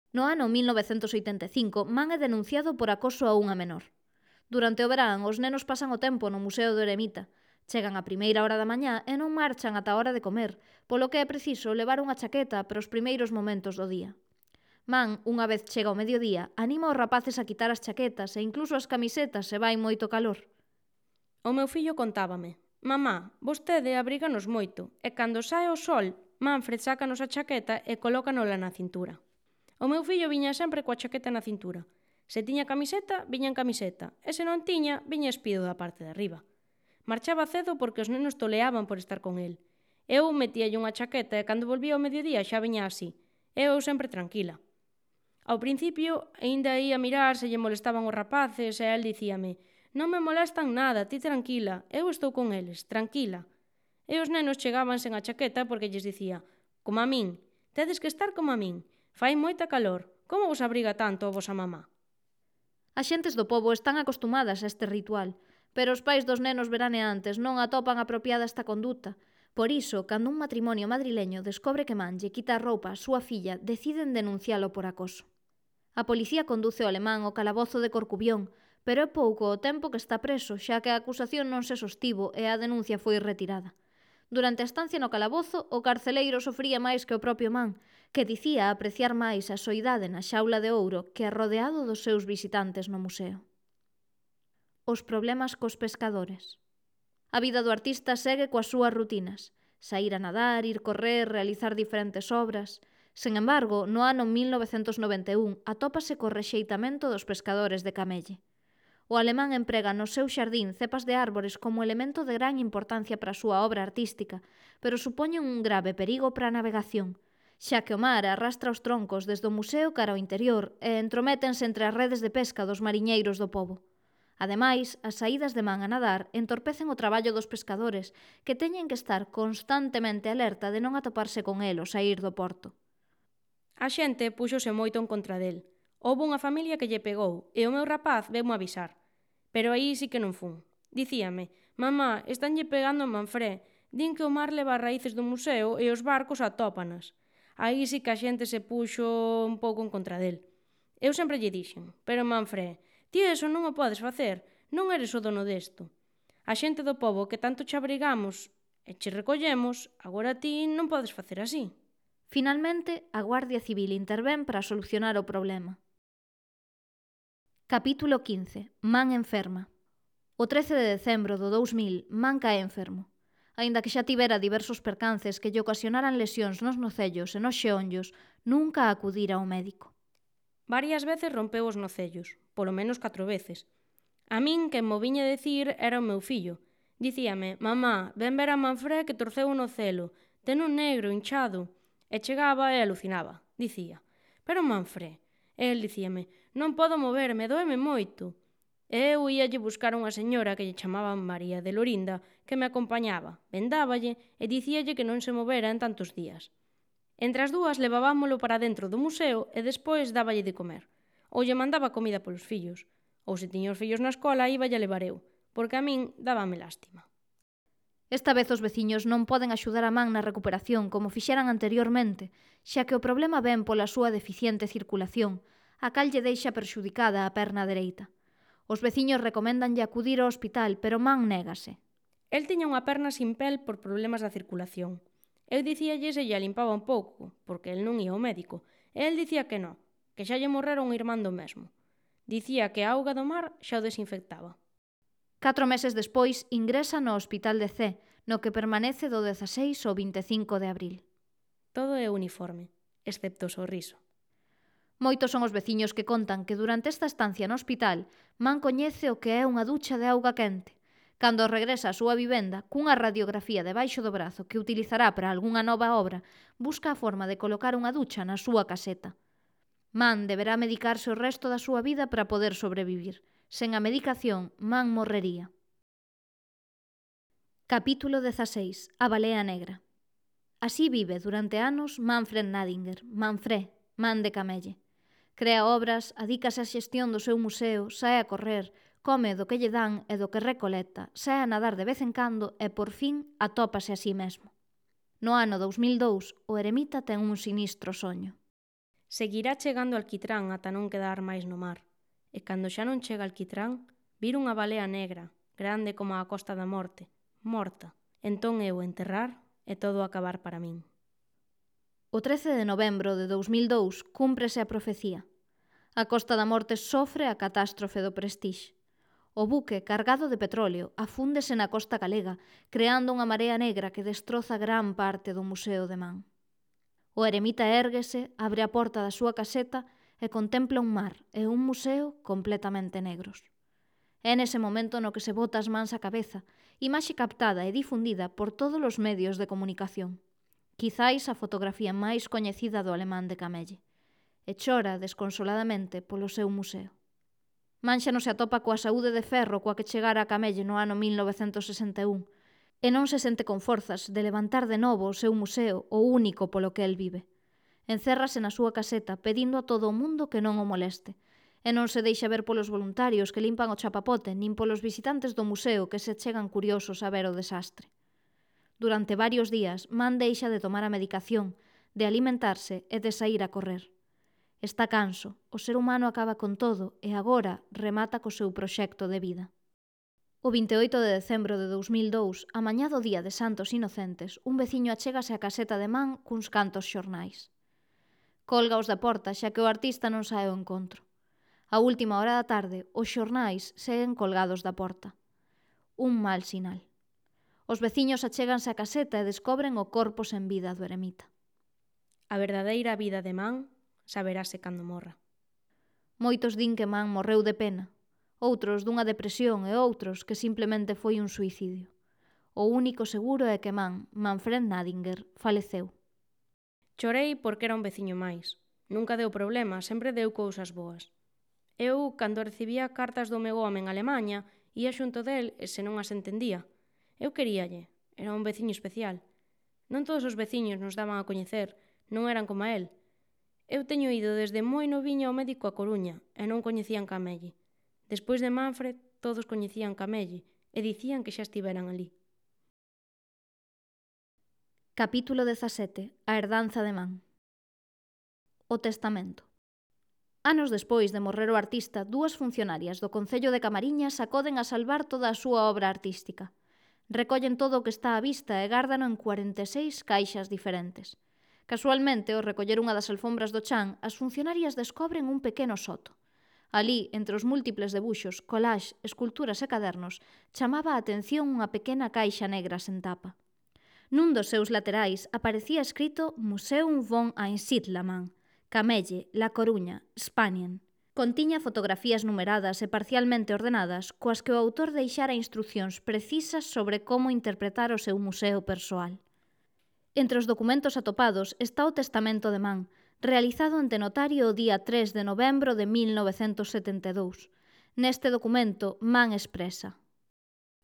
Speaker 1: No ano 1985, Man é denunciado por acoso a unha menor. Durante o verán, os nenos pasan o tempo no Museo do Eremita. Chegan a primeira hora da mañá e non marchan ata a hora de comer, polo que é preciso levar unha chaqueta para os primeiros momentos do día. Man, unha vez chega o mediodía, anima os rapaces a quitar as chaquetas e incluso as camisetas se vai moito calor.
Speaker 2: O meu fillo contábame: «Mamá, vostede abríganos moito, e cando sae o sol, Manfred sácanos a chaqueta e colócanola na cintura». O meu fillo viña sempre coa chaqueta na cintura. Se tiña camiseta, viña en camiseta, e se non tiña, viña espido da parte de arriba. Marchaba cedo porque os nenos toleaban por estar con el. Eu metíalle unha chaqueta e cando volvía ao mediodía xa viña así. Eu sempre tranquila. Ao principio, aínda ia mirar se lle molestaban os rapaces e el dicíame: «Non me molestan nada, ti tranquila, eu estou con eles, tranquila». E os nenos chegaban sen a chaqueta porque lles dicía: «Como a min, tedes que estar como a min, fai moita calor, como vos abriga tanto a vosa mamá?»
Speaker 1: As xentes do pobo están acostumadas a este ritual, pero os pais dos nenos veraneantes non atopan apropiada esta conduta. Por iso, cando un matrimonio madrileño descobre que man lle quita a roupa á súa filla, deciden denuncialo por acoso. A policía conduce o alemán ao calabozo de Corcubión, pero é pouco o tempo que está preso, xa que a acusación non se sostivo e a denuncia foi retirada. Durante a estancia no calabozo, o carceleiro sofría máis que o propio man, que dicía apreciar máis a soidade na xaula de ouro que rodeado dos seus visitantes no museo. Os problemas cos pescadores. A vida do artista segue coas súas rutinas: saír a nadar, ir correr, realizar diferentes obras. Sen embargo, no ano 1991 atópase co rexeitamento dos pescadores de Camelle. O alemán emprega no seu xardín cepas de árbores como elemento de gran importancia para a súa obra artística, pero supoñen un grave perigo para a navegación, xa que o mar arrastra os troncos desde o museo cara ao interior e entrométense entre as redes de pesca dos mariñeiros do pobo. Ademais, as saídas de man a nadar entorpecen o traballo dos pescadores, que teñen que estar constantemente alerta de non atoparse con el ao saír do porto.
Speaker 2: A xente púxose moito en contra del. Houbo unha familia que lle pegou e o meu rapaz veumo avisar. Pero aí sí que non fun. Dicíame: «Mamá, estánlle pegando a Manfred. Din que o mar leva as raíces do museo e os barcos atópanas». Aí sí que a xente se puxo un pouco en contra del. Eu sempre lle dixen: «Pero Manfred, ti eso non o podes facer, non eres o dono desto. A xente do pobo que tanto che abrigamos e che recollemos, agora ti non podes facer así».
Speaker 1: Finalmente, a Guardia Civil intervén para solucionar o problema. Capítulo 15. Man enferma. O 13 de decembro do 2000, Man cae enfermo. Aínda que xa tivera diversos percances que lle ocasionaran lesións nos nocellos e nos xeonllos, nunca acudira ao médico.
Speaker 2: Varias veces rompeu os nocellos, polo menos 4 veces. A min quen mo viña decir era o meu fillo. Dicíame: «Mamá, ven ver a Manfred que torceu o nocelo, ten un negro, hinchado». E chegaba e alucinaba. Dicía: «Pero Manfred». E el dicíame: «Non podo moverme, doeme moito». E eu íalle buscar unha señora que lle chamaban María de Lorinda, que me acompañaba, vendáballe e dicíalle que non se movera en tantos días. Entre as dúas levábamolo para dentro do museo e despois dáballe de comer. Ou lle mandaba comida polos fillos. Ou se tiña os fillos na escola, íballe a levar eu, porque a min dábame lástima.
Speaker 1: Esta vez os veciños non poden axudar a man na recuperación como fixeran anteriormente, xa que o problema ven pola súa deficiente circulación, a cal lle deixa perxudicada a perna dereita. Os veciños recoméndanlle acudir ao hospital, pero man négase.
Speaker 2: El tiña unha perna sin pel por problemas da circulación. Eu dicíalle se lle limpaba un pouco, porque el non ia ao médico, e el dicía que non, que xa lle morrera un irmán do mesmo. Dicía que a auga do mar xa o desinfectaba.
Speaker 1: 4 meses despois ingresa no Hospital de Cee, no que permanece do 16 ao 25 de abril.
Speaker 2: Todo é uniforme, excepto o sorriso.
Speaker 1: Moitos son os veciños que contan que durante esta estancia no hospital man coñece o que é unha ducha de auga quente. Cando regresa á súa vivenda, cunha radiografía debaixo do brazo que utilizará para algunha nova obra, busca a forma de colocar unha ducha na súa caseta. Man deberá medicarse o resto da súa vida para poder sobrevivir. Sen a medicación, man morrería. Capítulo 16. A balea negra. Así vive durante anos Manfred Nadinger, Manfred, man de Camelle. Crea obras, adícase á xestión do seu museo, sae a correr, come do que lle dan e do que recolecta, sae a nadar de vez en cando e, por fin, atópase a sí mesmo. No ano 2002, o eremita ten un sinistro soño.
Speaker 2: Seguirá chegando alquitrán ata non quedar máis no mar. E cando xa non chega alquitrán, vir unha balea negra, grande como a Costa da Morte, morta. Entón eu enterrar e todo acabar para min.
Speaker 1: O 13 de novembro de 2002 cúmprese a profecía. A Costa da Morte sofre a catástrofe do Prestige. O buque, cargado de petróleo, afúndese na costa galega, creando unha marea negra que destroza gran parte do Museo de Man. O eremita érguese, abre a porta da súa caseta e contempla un mar e un museo completamente negros. É nese momento no que se bota as mans á cabeza, imaxe captada e difundida por todos os medios de comunicación. Quizáis a fotografía máis coñecida do alemán de Camelle. E chora desconsoladamente polo seu museo. Man xa non se atopa coa saúde de ferro coa que chegara a Camelle no ano 1961 e non se sente con forzas de levantar de novo o seu museo, o único polo que el vive. Encérrase na súa caseta pedindo a todo o mundo que non o moleste e non se deixa ver polos voluntarios que limpan o chapapote nin polos visitantes do museo que se chegan curiosos a ver o desastre. Durante varios días, Man deixa de tomar a medicación, de alimentarse e de sair a correr. Está canso, o ser humano acaba con todo e agora remata co seu proxecto de vida. O 28 de decembro de 2002, a mañá do día de Santos Inocentes, un veciño achégase á caseta de Man cuns cantos xornais. Colgaos da porta xa que o artista non sae ao encontro. A última hora da tarde, os xornais seguen colgados da porta. Un mal sinal. Os veciños achéganse á caseta e descobren o corpo sen vida do eremita.
Speaker 2: A verdadeira vida de Man saberase cando morra.
Speaker 1: Moitos din que Man morreu de pena, outros dunha depresión e outros que simplemente foi un suicidio. O único seguro é que Manfred Nadinger, faleceu.
Speaker 2: Chorei porque era un veciño máis. Nunca deu problema, sempre deu cousas boas. Eu, cando recibía cartas do meu home en Alemanha, ia xunto del e se non as entendía. Eu queríalle, era un veciño especial. Non todos os veciños nos daban a coñecer, non eran como a el. Eu teño ido desde moi noviña ao médico a Coruña e non coñecían Camelle. Despois de Manfred, todos coñecían Camelle e dicían que xa estiveran ali.
Speaker 1: Capítulo 17. A herdanza de Man. O testamento. Anos despois de morrer o artista, dúas funcionarias do Concello de Camariñas acoden a salvar toda a súa obra artística. Recollen todo o que está á vista e gárdano en 46 caixas diferentes. Casualmente, ao recoller unha das alfombras do chan, as funcionarias descobren un pequeno soto. Alí, entre os múltiples debuxos, collage, esculturas e cadernos, chamaba a atención unha pequena caixa negra sen tapa. Nun dos seus laterais aparecía escrito Museum von Einsiedlermann, Camelle, La Coruña, Spanien. Contiña fotografías numeradas e parcialmente ordenadas coas que o autor deixara instruccións precisas sobre como interpretar o seu museo persoal. Entre os documentos atopados está o testamento de Man, realizado ante notario o día 3 de novembro de 1972. Neste documento, Man expresa: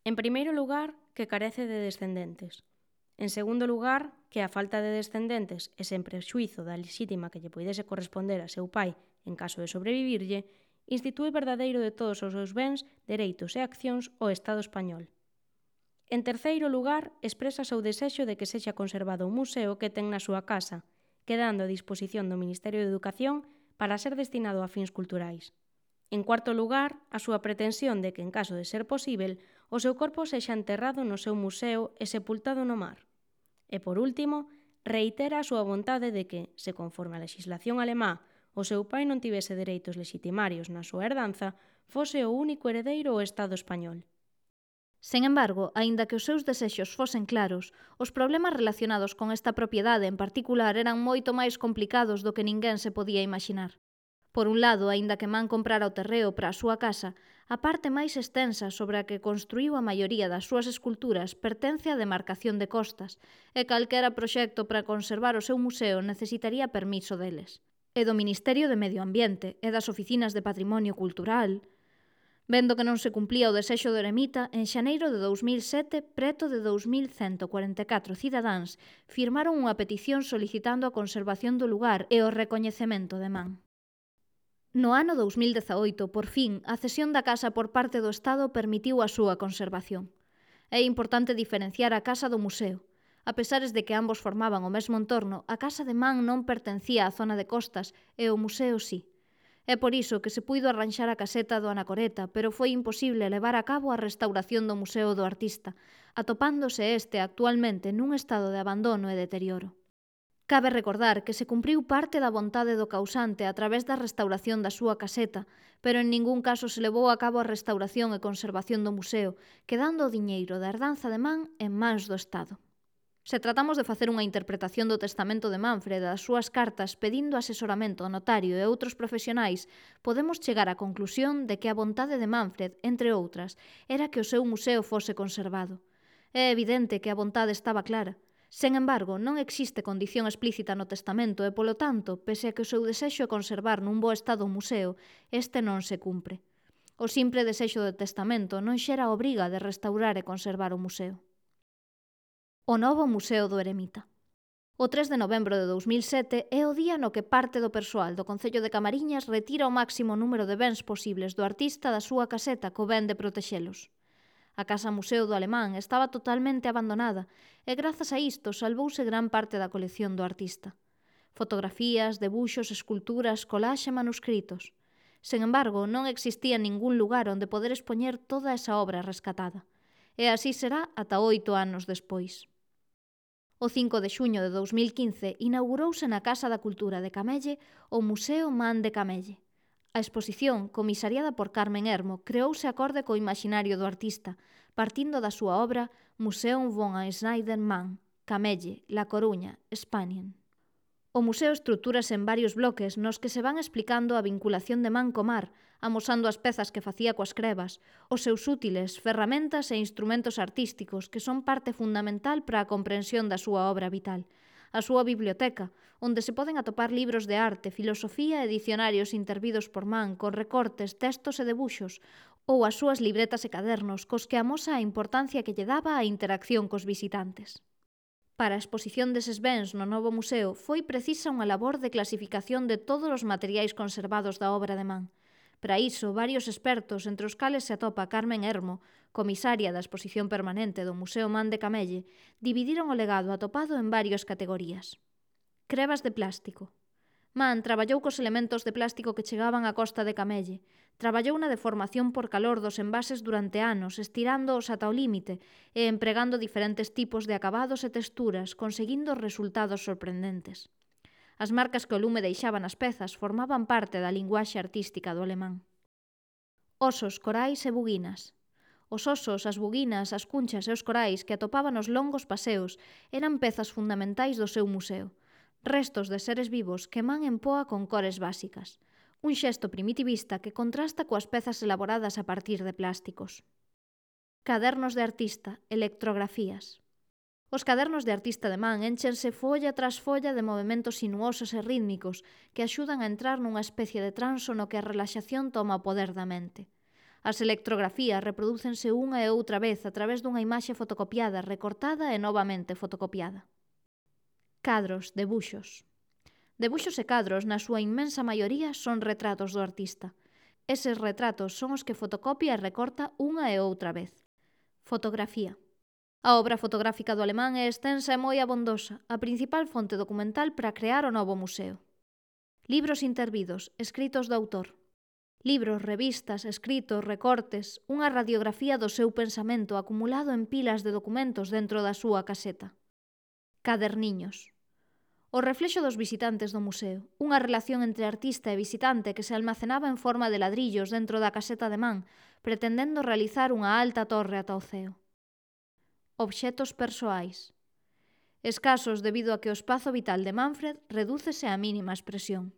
Speaker 2: En primeiro lugar, que carece de descendentes. En segundo lugar, que a falta de descendentes e sen prexuízo da lexítima que lle poidese corresponder a seu pai en caso de sobrevivirlle, institue verdadeiro de todos os seus bens, dereitos e accións o Estado español. En terceiro lugar, expresa o seu desexo de que sexa conservado un museo que ten na súa casa, quedando a disposición do Ministerio de Educación para ser destinado a fins culturais. En cuarto lugar, a súa pretensión de que, en caso de ser posíbel, o seu corpo sexa enterrado no seu museo e sepultado no mar. E, por último, reitera a súa vontade de que, se conforme a legislación alemá, o seu pai non tivese dereitos legitimarios na súa herdanza, fose o único heredeiro o Estado español.
Speaker 1: Sen embargo, aínda que os seus desexos fosen claros, os problemas relacionados con esta propiedade en particular eran moito máis complicados do que ninguén se podía imaginar. Por un lado, aínda que Man comprara o terreo para a súa casa, a parte máis extensa sobre a que construíu a maioría das súas esculturas pertence á demarcación de costas, e calquera proxecto para conservar o seu museo necesitaría permiso deles. E do Ministerio de Medio Ambiente e das Oficinas de Patrimonio Cultural. Vendo que non se cumplía o desexo do eremita, en xaneiro de 2007, preto de 2.144 cidadáns firmaron unha petición solicitando a conservación do lugar e o recoñecemento de Man. No ano 2018, por fin, a cesión da casa por parte do Estado permitiu a súa conservación. É importante diferenciar a casa do museo. A pesares de que ambos formaban o mesmo entorno, a casa de Man non pertencía á zona de costas e o museo sí. É por iso que se puido arranxar a caseta do Anacoreta, pero foi imposible levar a cabo a restauración do Museo do Artista, atopándose este actualmente nun estado de abandono e deterioro. Cabe recordar que se cumpriu parte da vontade do causante a través da restauración da súa caseta, pero en ningún caso se levou a cabo a restauración e conservación do museo, quedando o diñeiro da herdanza de Man en mans do Estado. Se tratamos de facer unha interpretación do testamento de Manfred e das súas cartas pedindo asesoramento ao notario e outros profesionais, podemos chegar á conclusión de que a vontade de Manfred, entre outras, era que o seu museo fose conservado. É evidente que a vontade estaba clara. Sen embargo, non existe condición explícita no testamento e, polo tanto, pese a que o seu desexo é conservar nun bo estado o museo, este non se cumpre. O simple desexo do testamento non xera a obriga de restaurar e conservar o museo. O novo Museo do Eremita. O 3 de novembro de 2007 é o día no que parte do persoal do Concello de Camariñas retira o máximo número de bens posibles do artista da súa caseta co ben de protexelos. A Casa Museo do Alemán estaba totalmente abandonada e grazas a isto salvouse gran parte da colección do artista. Fotografías, debuxos, esculturas, collaxe e manuscritos. Sen embargo, non existía ningún lugar onde poder expoñer toda esa obra rescatada. E así será ata 8 anos despois. O 5 de xuño de 2015 inaugurouse na Casa da Cultura de Camelle o Museo Man de Camelle. A exposición, comisariada por Carmen Hermo, creouse acorde co imaginario do artista, partindo da súa obra Museum von Schneider Man, Camelle, La Coruña, Spanien. O museo estruturase en varios bloques nos que se van explicando a vinculación de Man co mar, amosando as pezas que facía coas crebas, os seus útiles, ferramentas e instrumentos artísticos que son parte fundamental para a comprensión da súa obra vital, a súa biblioteca, onde se poden atopar libros de arte, filosofía e dicionarios intervidos por Man con recortes, textos e debuxos, ou as súas libretas e cadernos cos que amosa a importancia que lle daba a interacción cos visitantes. Para a exposición deses bens no novo museo foi precisa unha labor de clasificación de todos os materiais conservados da obra de Man. Para iso, varios expertos, entre os cales se atopa Carmen Hermo, comisaria da exposición permanente do Museo Man de Camelle, dividiron o legado atopado en varias categorías. Crebas de plástico. Man traballou cos elementos de plástico que chegaban á costa de Camelle. Traballou na deformación por calor dos envases durante anos, estirándoos ata o límite e empregando diferentes tipos de acabados e texturas, conseguindo resultados sorprendentes. As marcas que o lume deixaba nas pezas formaban parte da linguaxe artística do alemán. Osos, corais e buguinas. Os osos, as buguinas, as cunchas e os corais que atopaban nos longos paseos eran pezas fundamentais do seu museo. Restos de seres vivos que Man empoa con cores básicas. Un xesto primitivista que contrasta coas pezas elaboradas a partir de plásticos. Cadernos de artista, electrografías. Os cadernos de artista de Man énchense folla tras folla de movementos sinuosos e rítmicos que axudan a entrar nunha especie de transo no que a relaxación toma o poder da mente. As electrografías reprodúcense unha e outra vez a través dunha imaxe fotocopiada, recortada e novamente fotocopiada. Cadros, debuxos. Debuxos e cadros, na súa inmensa maioría, son retratos do artista. Eses retratos son os que fotocopia e recorta unha e outra vez. Fotografía. A obra fotográfica do alemán é extensa e moi abondosa, a principal fonte documental para crear o novo museo. Libros intervidos, escritos do autor. Libros, revistas, escritos, recortes, unha radiografía do seu pensamento acumulado en pilas de documentos dentro da súa caseta. Caderniños. O reflexo dos visitantes do museo, unha relación entre artista e visitante que se almacenaba en forma de ladrillos dentro da caseta de Man, pretendendo realizar unha alta torre ata o ceo. Obxetos persoais. Escasos debido a que o espazo vital de Manfred redúcese á mínima expresión.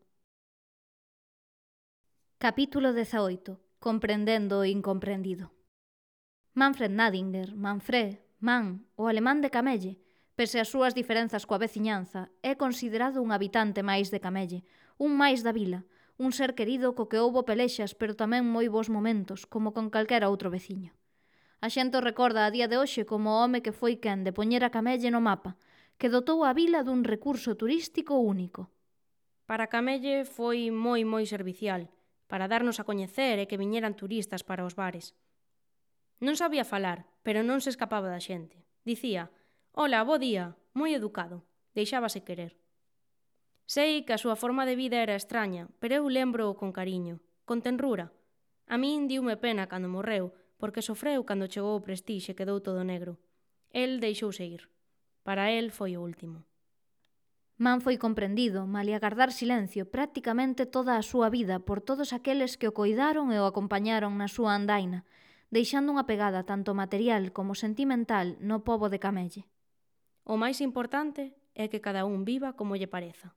Speaker 1: Capítulo 18. Comprendendo o incomprendido. Manfred Nadinger, Manfred, Man, o alemán de Camelle, pese ás súas diferenzas coa veciñanza, é considerado un habitante máis de Camelle, un máis da vila, un ser querido co que houbo pelexas pero tamén moi bons momentos, como con calquera outro veciño. A xente o recorda a día de hoxe como o home que foi quen de poñer a Camelle no mapa, que dotou a vila dun recurso turístico único.
Speaker 2: Para Camelle foi moi servicial, para darnos a coñecer e que viñeran turistas para os bares. Non sabía falar, pero non se escapaba da xente. Dicía: «Ola, bo día», moi educado, deixábase querer. Sei que a súa forma de vida era extraña, pero eu lembro-o con cariño, con tenrura. A min diume pena cando morreu, porque sofreu cando chegou o Prestige e quedou todo negro. El deixouse ir. Para el foi o último.
Speaker 1: Man foi comprendido, malia gardar silencio, prácticamente toda a súa vida por todos aqueles que o coidaron e o acompañaron na súa andaina, deixando unha pegada tanto material como sentimental no pobo de Camelle.
Speaker 2: O máis importante é que cada un viva como lle pareza.